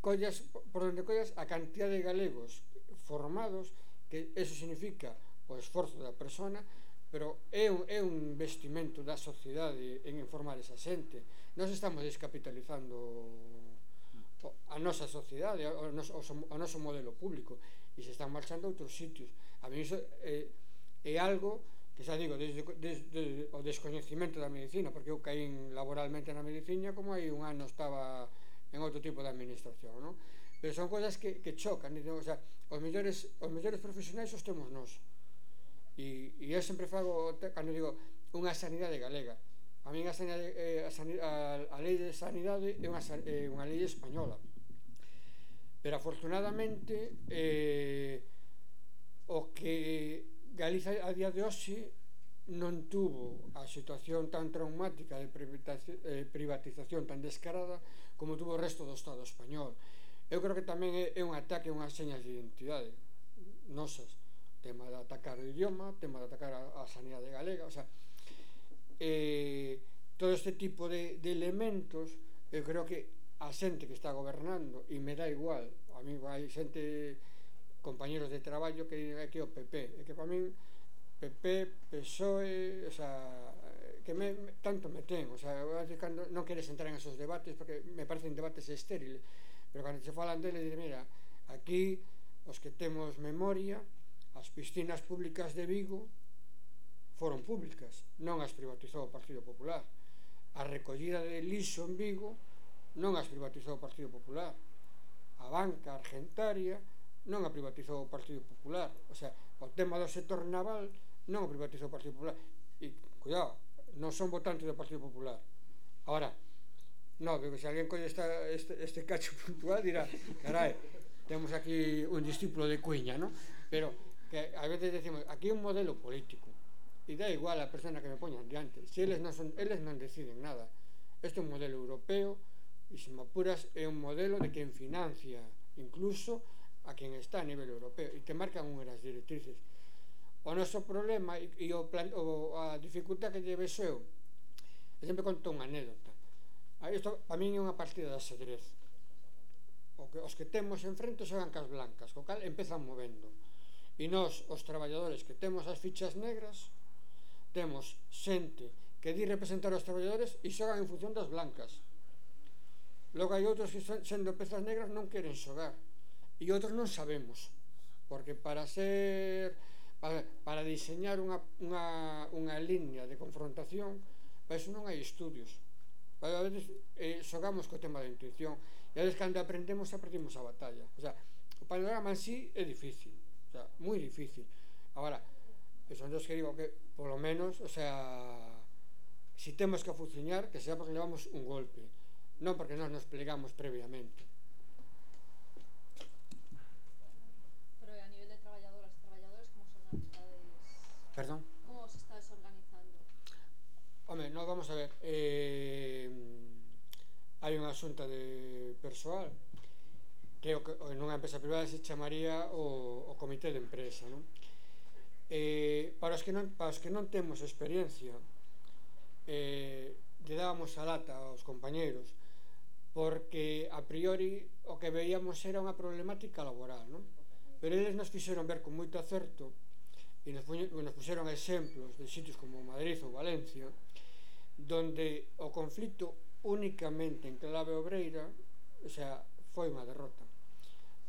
collas, por onde collas a cantidad de galegos formados, que eso significa o esforzo da persona, pero é un, é un investimento da sociedade en informar esa xente. Nós estamos descapitalizando a nosa sociedade, o noso, o noso modelo público, e se están marchando a outros sitios. A mí iso é, é algo que xa digo, desde, desde o descoñecimento da medicina, porque eu caín laboralmente na medicina como hai un ano estaba en outro tipo de administración, non? Pero son cousas que, que chocan, o sea, os mellores, os mellores profesionais os temos nós. E, e eu sempre fago, cando digo, unha sanidade galega. A mí a, sanidade, eh, a, sanidade, a, a lei de sanidade é unha, eh, unha lei española. Pero afortunadamente eh, o que Galiza a día de hoxe non tuvo a situación tan traumática de privatización tan descarada como tuvo o resto do Estado español. Eu creo que tamén é un ataque a unhas señas de identidade nosas, tema de atacar o idioma, tema de atacar a, a sanidade galega, o sea, eh, todo este tipo de, de elementos. Eu creo que a xente que está gobernando, e me dá igual, a mí hai xente, compañeros de traballo que diga que o P P, e que para min P P, P S O E, o sea, que me, me, tanto me ten, o sea, cando non queres entrar en esos debates porque me parecen debates estériles, pero cando se falan deles, dice, mira, aquí os que temos memoria, as piscinas públicas de Vigo foron públicas, non as privatizou o Partido Popular. A recollida de lixo en Vigo non as privatizou o Partido Popular. A banca argentaria non a privatizou o Partido Popular. O sea, o tema do sector naval non o privatizou o Partido Popular. E, cuidado, non son votantes do Partido Popular. Ahora, non, porque se alguén colle esta, este, este cacho puntual dirá, carai, temos aquí un discípulo de Cuña, non? Pero que a veces decimos, aquí é un modelo político e dá igual a persona que me poñan diante, se eles non, son, eles non deciden nada. Este é un modelo europeo e, se me apuras, é un modelo de quen financia incluso a quen está a nivel europeo e te marcan unhas directrices. O noso problema e, e o plan, o, a dificultad que lle vexo eu, eu sempre conto unha anécdota. Isto para min é unha partida de ajedrez. O que, os que temos enfrente xogan cas blancas, co cal empezan movendo. E nós, os traballadores que temos as fichas negras, temos xente que di representar os traballadores e xogan en función das blancas. Logo hai outros que sendo pezas negras non queren xogar e outros non sabemos, porque para ser para, para diseñar unha, unha, unha línea de confrontación, para eso non hai estudios. A veces eh, xogamos co tema da intuición e a veces cando aprendemos aprendemos a batalla. O sea, o panorama en sí é difícil, o sea, moi difícil. Agora, son dos que digo que polo menos, o sea, si temos que fuciñar, que sea porque levamos un golpe, non porque nós nos plegamos previamente. Pero a nivel de traballadoras e traballadores, como son as estades? Perdón? Como os estades organizando? Home, non, vamos a ver, eh, hai unha xunta de persoal que nunha empresa privada se chamaría o, o comité de empresa, non? Eh, para, os que non, para os que non temos experiencia, eh, lle dábamos a lata aos compañeiros porque a priori o que veíamos era unha problemática laboral, non? Pero eles nos fixeron ver con moito acerto e nos, nos puxeron exemplos de sitios como Madrid ou Valencia donde o conflito únicamente en clave obreira, o sea, foi unha derrota.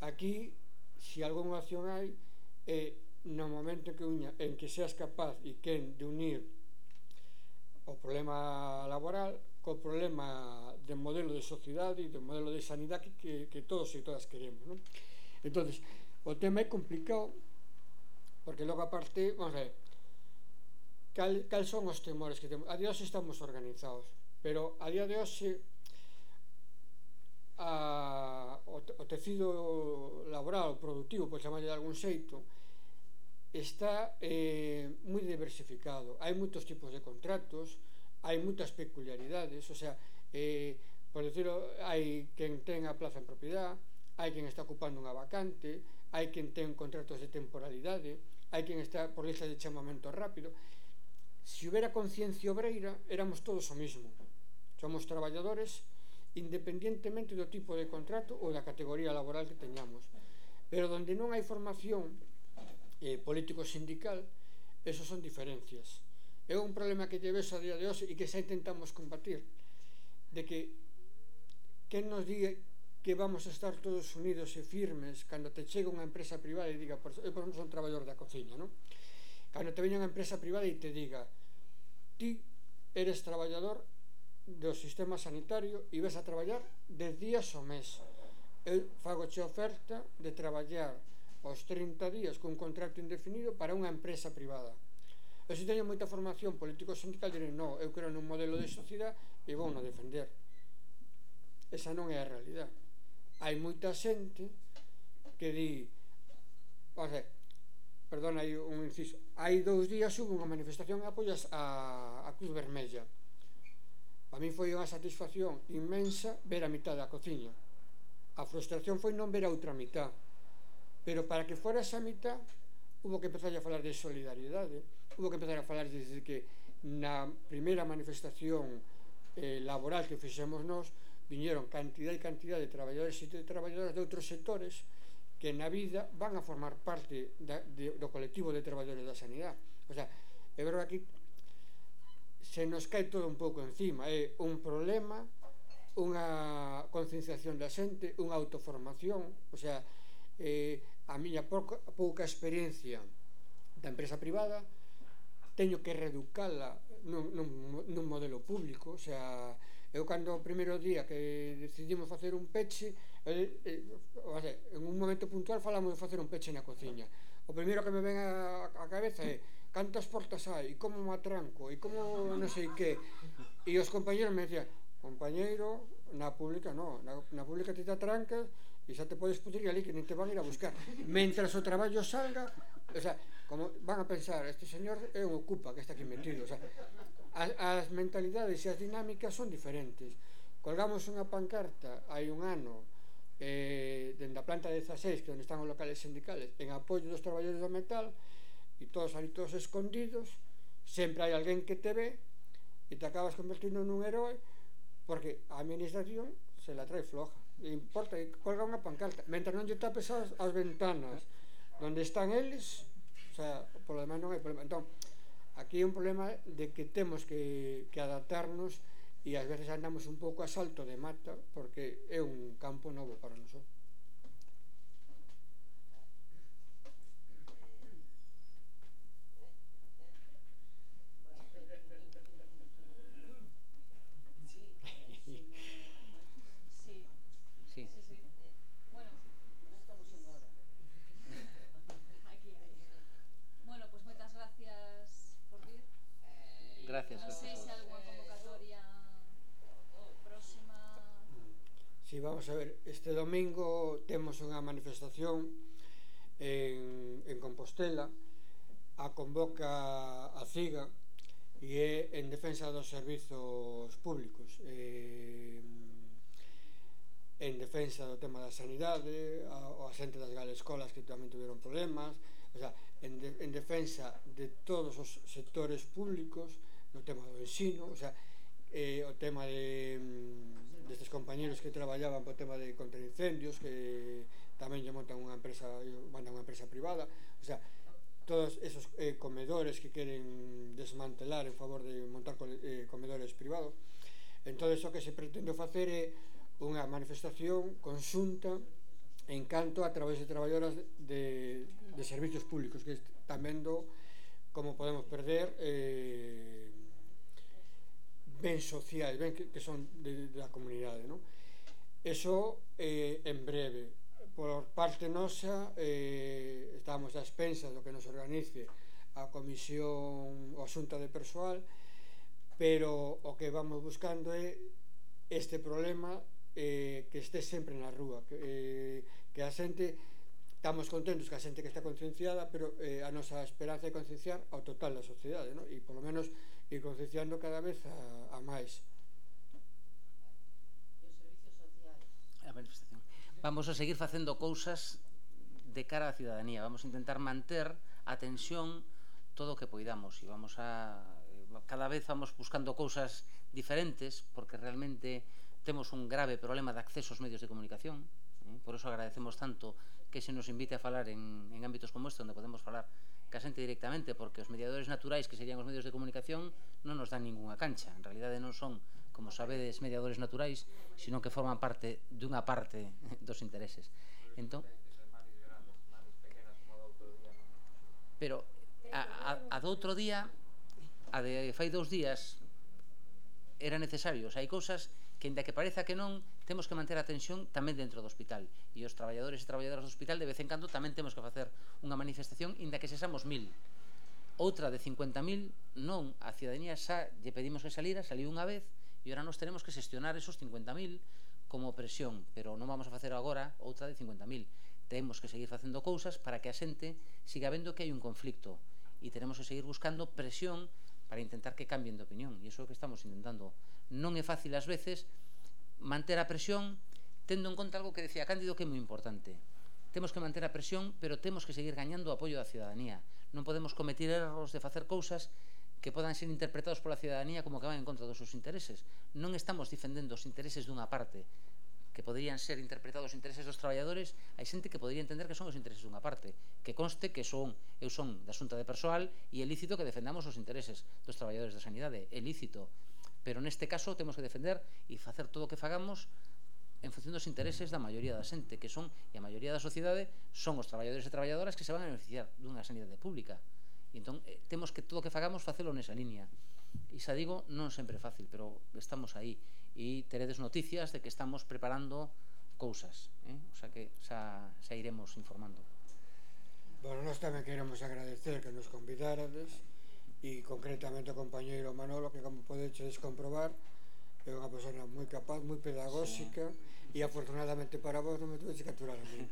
Aquí, se algunha acción hai, é no momento que uña, en que seas capaz e quen de unir o problema laboral co problema de modelo de sociedade e do modelo de sanidade que, que todos e todas queremos, non? Entonces, o tema é complicado porque logo aparte, vamos a ver, cal, cal son os temores que temos. A día de hoxe estamos organizados, pero a día de hoxe a, o, o tecido laboral, o productivo, por chamarlle de algún xeito, está eh, moi diversificado. Hai moitos tipos de contratos, hai moitas peculiaridades, o sea, eh, por decirlo, hai quen ten a plaza en propiedad, hai quen está ocupando unha vacante, hai quen ten contratos de temporalidade, hai quen está por lista de chamamento rápido. Se houbera conciencia obreira, éramos todos o mismo. Somos traballadores independientemente do tipo de contrato ou da categoría laboral que teñamos. Pero donde non hai formación eh, político-sindical, esos son diferencias. É un problema que lle ves a día de hoxe e que xa intentamos combatir, de que quen nos diga que vamos a estar todos unidos e firmes cando te chega unha empresa privada e diga, por, eu por exemplo son traballador da cociña, non? Cando te veña unha empresa privada e te diga, ti eres traballador do sistema sanitario e vas a traballar dez días ao mes, eu fagoche oferta de traballar aos trinta días con un contrato indefinido para unha empresa privada. Eu se teño moita formación político-sindical direi, non, eu creo nun modelo de sociedade e vou non defender. Esa non é a realidade. Hai moita xente que di, o sea, perdona, hai un inciso, hai dous días hubo unha manifestación en apoio a, a Cruz Vermella. A mí foi unha satisfacción inmensa ver a mitad da cociña. A frustración foi non ver a outra mitad, pero para que fora esa mitad hubo que empezar a falar de solidariedade, hubo que empezar a falar desde que na primeira manifestación eh, laboral que fixemos nós viñeron cantidad e cantidad de traballadores e de traballadoras de outros sectores que na vida van a formar parte da, de, do colectivo de traballadores da sanidade. O sea, é verdade que aquí se nos cae todo un pouco encima, é un problema, unha concienciación da xente, unha autoformación, o sea, eh, a miña pouca, pouca experiencia da empresa privada teño que reeducala nun, nun, nun modelo público. O sea, eu cando o primeiro día que decidimos facer un peche, eh, eh, o sea, en un momento puntual falamos de facer un peche na cociña, o primeiro que me ven a, a cabeza é cantas portas hai, e como me atranco, e como non sei que, e os compañeros me decían, compañeiro, na pública non, na, na pública te te atrancas e xa te podes pudrir ali que nem te van a ir a buscar, mentras o traballo salga. O sea, como van a pensar, este señor é un ocupa que está aquí metido. O sea, as, as mentalidades e as dinámicas son diferentes. Colgamos unha pancarta hai un ano eh, dende a planta dezaseis, que onde están os locales sindicales, en apoio dos traballadores do metal, e todos ali todos escondidos, sempre hai alguén que te ve e te acabas convertindo nun heroe porque a administración se la trae floja. E importa que colga unha pancarta, mentre non lle tapes as, as ventanas onde están eles, o sea, por lo demás non hai problema. Entón, aquí é un problema de que temos que, que adaptarnos e ás veces andamos un pouco a salto de mata porque é un campo novo para nosotros. Gracias. Non sei se alguna convocatoria próxima. Si, sí, vamos a ver, este domingo temos unha manifestación en, en Compostela, a convoca a CIGA e é en defensa dos servizos públicos, eh, en defensa do tema da sanidade, a, a xente das galescolas que tamén tuveron problemas, o sea, en, de, en defensa de todos os sectores públicos, no tema do ensino, o sea, eh, o tema de destes compañeros que traballaban po tema de contraincendios, que tamén lle montan unha empresa, mandan unha empresa privada, o sea, todos esos eh, comedores que queren desmantelar en favor de montar eh, comedores privados. Entón, o que se pretende facer é unha manifestación conxunta en canto a través de traballadoras de, de servicios públicos que están vendo como podemos perder eh, ben sociais, ben que, que son de, de la comunidade, non? Eso eh, en breve. Por parte nosa eh, estamos a expensas do que nos organice a comisión ou xunta de persoal, pero o que vamos buscando é este problema eh, que este sempre na rúa, que, eh, que a xente, estamos contentos que a xente que está concienciada, pero eh, a nosa esperanza é concienciar ao total da sociedade, ¿no? E polo menos ir concienciando cada vez a, a máis. E os servicios sociais? A manifestación. Vamos a seguir facendo cousas de cara á ciudadanía, vamos a intentar manter a tensión todo o que poidamos e vamos a cada vez vamos buscando cousas diferentes porque realmente temos un grave problema de acceso aos medios de comunicación, eh? Por eso agradecemos tanto que se nos invite a falar en, en ámbitos como este onde podemos falar ca xente directamente, porque os mediadores naturais que serían os medios de comunicación non nos dan ninguna cancha, en realidade non son, como sabedes, mediadores naturais, sino que forman parte dunha parte dos intereses. Entón, pero a, a, a do outro día, a de fai dous días, era necesario. O sea, hai cousas que, ainda que pareza que non, temos que manter a tensión tamén dentro do hospital. E os traballadores e traballadoras do hospital, de vez en cando, tamén temos que facer unha manifestación, ainda que sexamos mil. Outra de cincuenta mil, non. A ciudadanía xa lle pedimos que salira, saliu unha vez, e ora nos tenemos que xestionar esos cincuenta mil como presión, pero non vamos a facer agora outra de cincuenta mil. Temos que seguir facendo cousas para que a xente siga vendo que hai un conflicto e tenemos que seguir buscando presión para intentar que cambien de opinión, e iso é o que estamos intentando. Non é fácil ás veces manter a presión tendo en conta algo que decía Cándido que é moi importante. Temos que manter a presión, pero temos que seguir gañando o apoio da ciudadanía. Non podemos cometer erros de facer cousas que podan ser interpretados pola ciudadanía como que van en contra dos seus intereses. Non estamos defendendo os intereses dunha parte, que poderían ser interpretados os intereses dos traballadores. Hai xente que podría entender que son os intereses dunha parte, que conste que son, eu son da xunta de persoal e é lícito que defendamos os intereses dos traballadores da sanidade, é lícito, pero neste caso temos que defender e facer todo o que fagamos en función dos intereses da maioría da xente, que son, e a maioría da sociedade son os traballadores e traballadoras que se van a beneficiar dunha sanidade pública. E entón eh, temos que todo o que fagamos facelo nesa línea. E xa digo, non sempre é fácil, pero estamos aí e teredes noticias de que estamos preparando cousas, eh? O sea que xa, xa iremos informando. Bueno, nós tamén queremos agradecer que nos convidárades e concretamente ao compañeiro Manolo, que como podedes comprobar é unha persona moi capaz, moi pedagóxica, sí. E afortunadamente para vos non me tuveche que aturar a mí.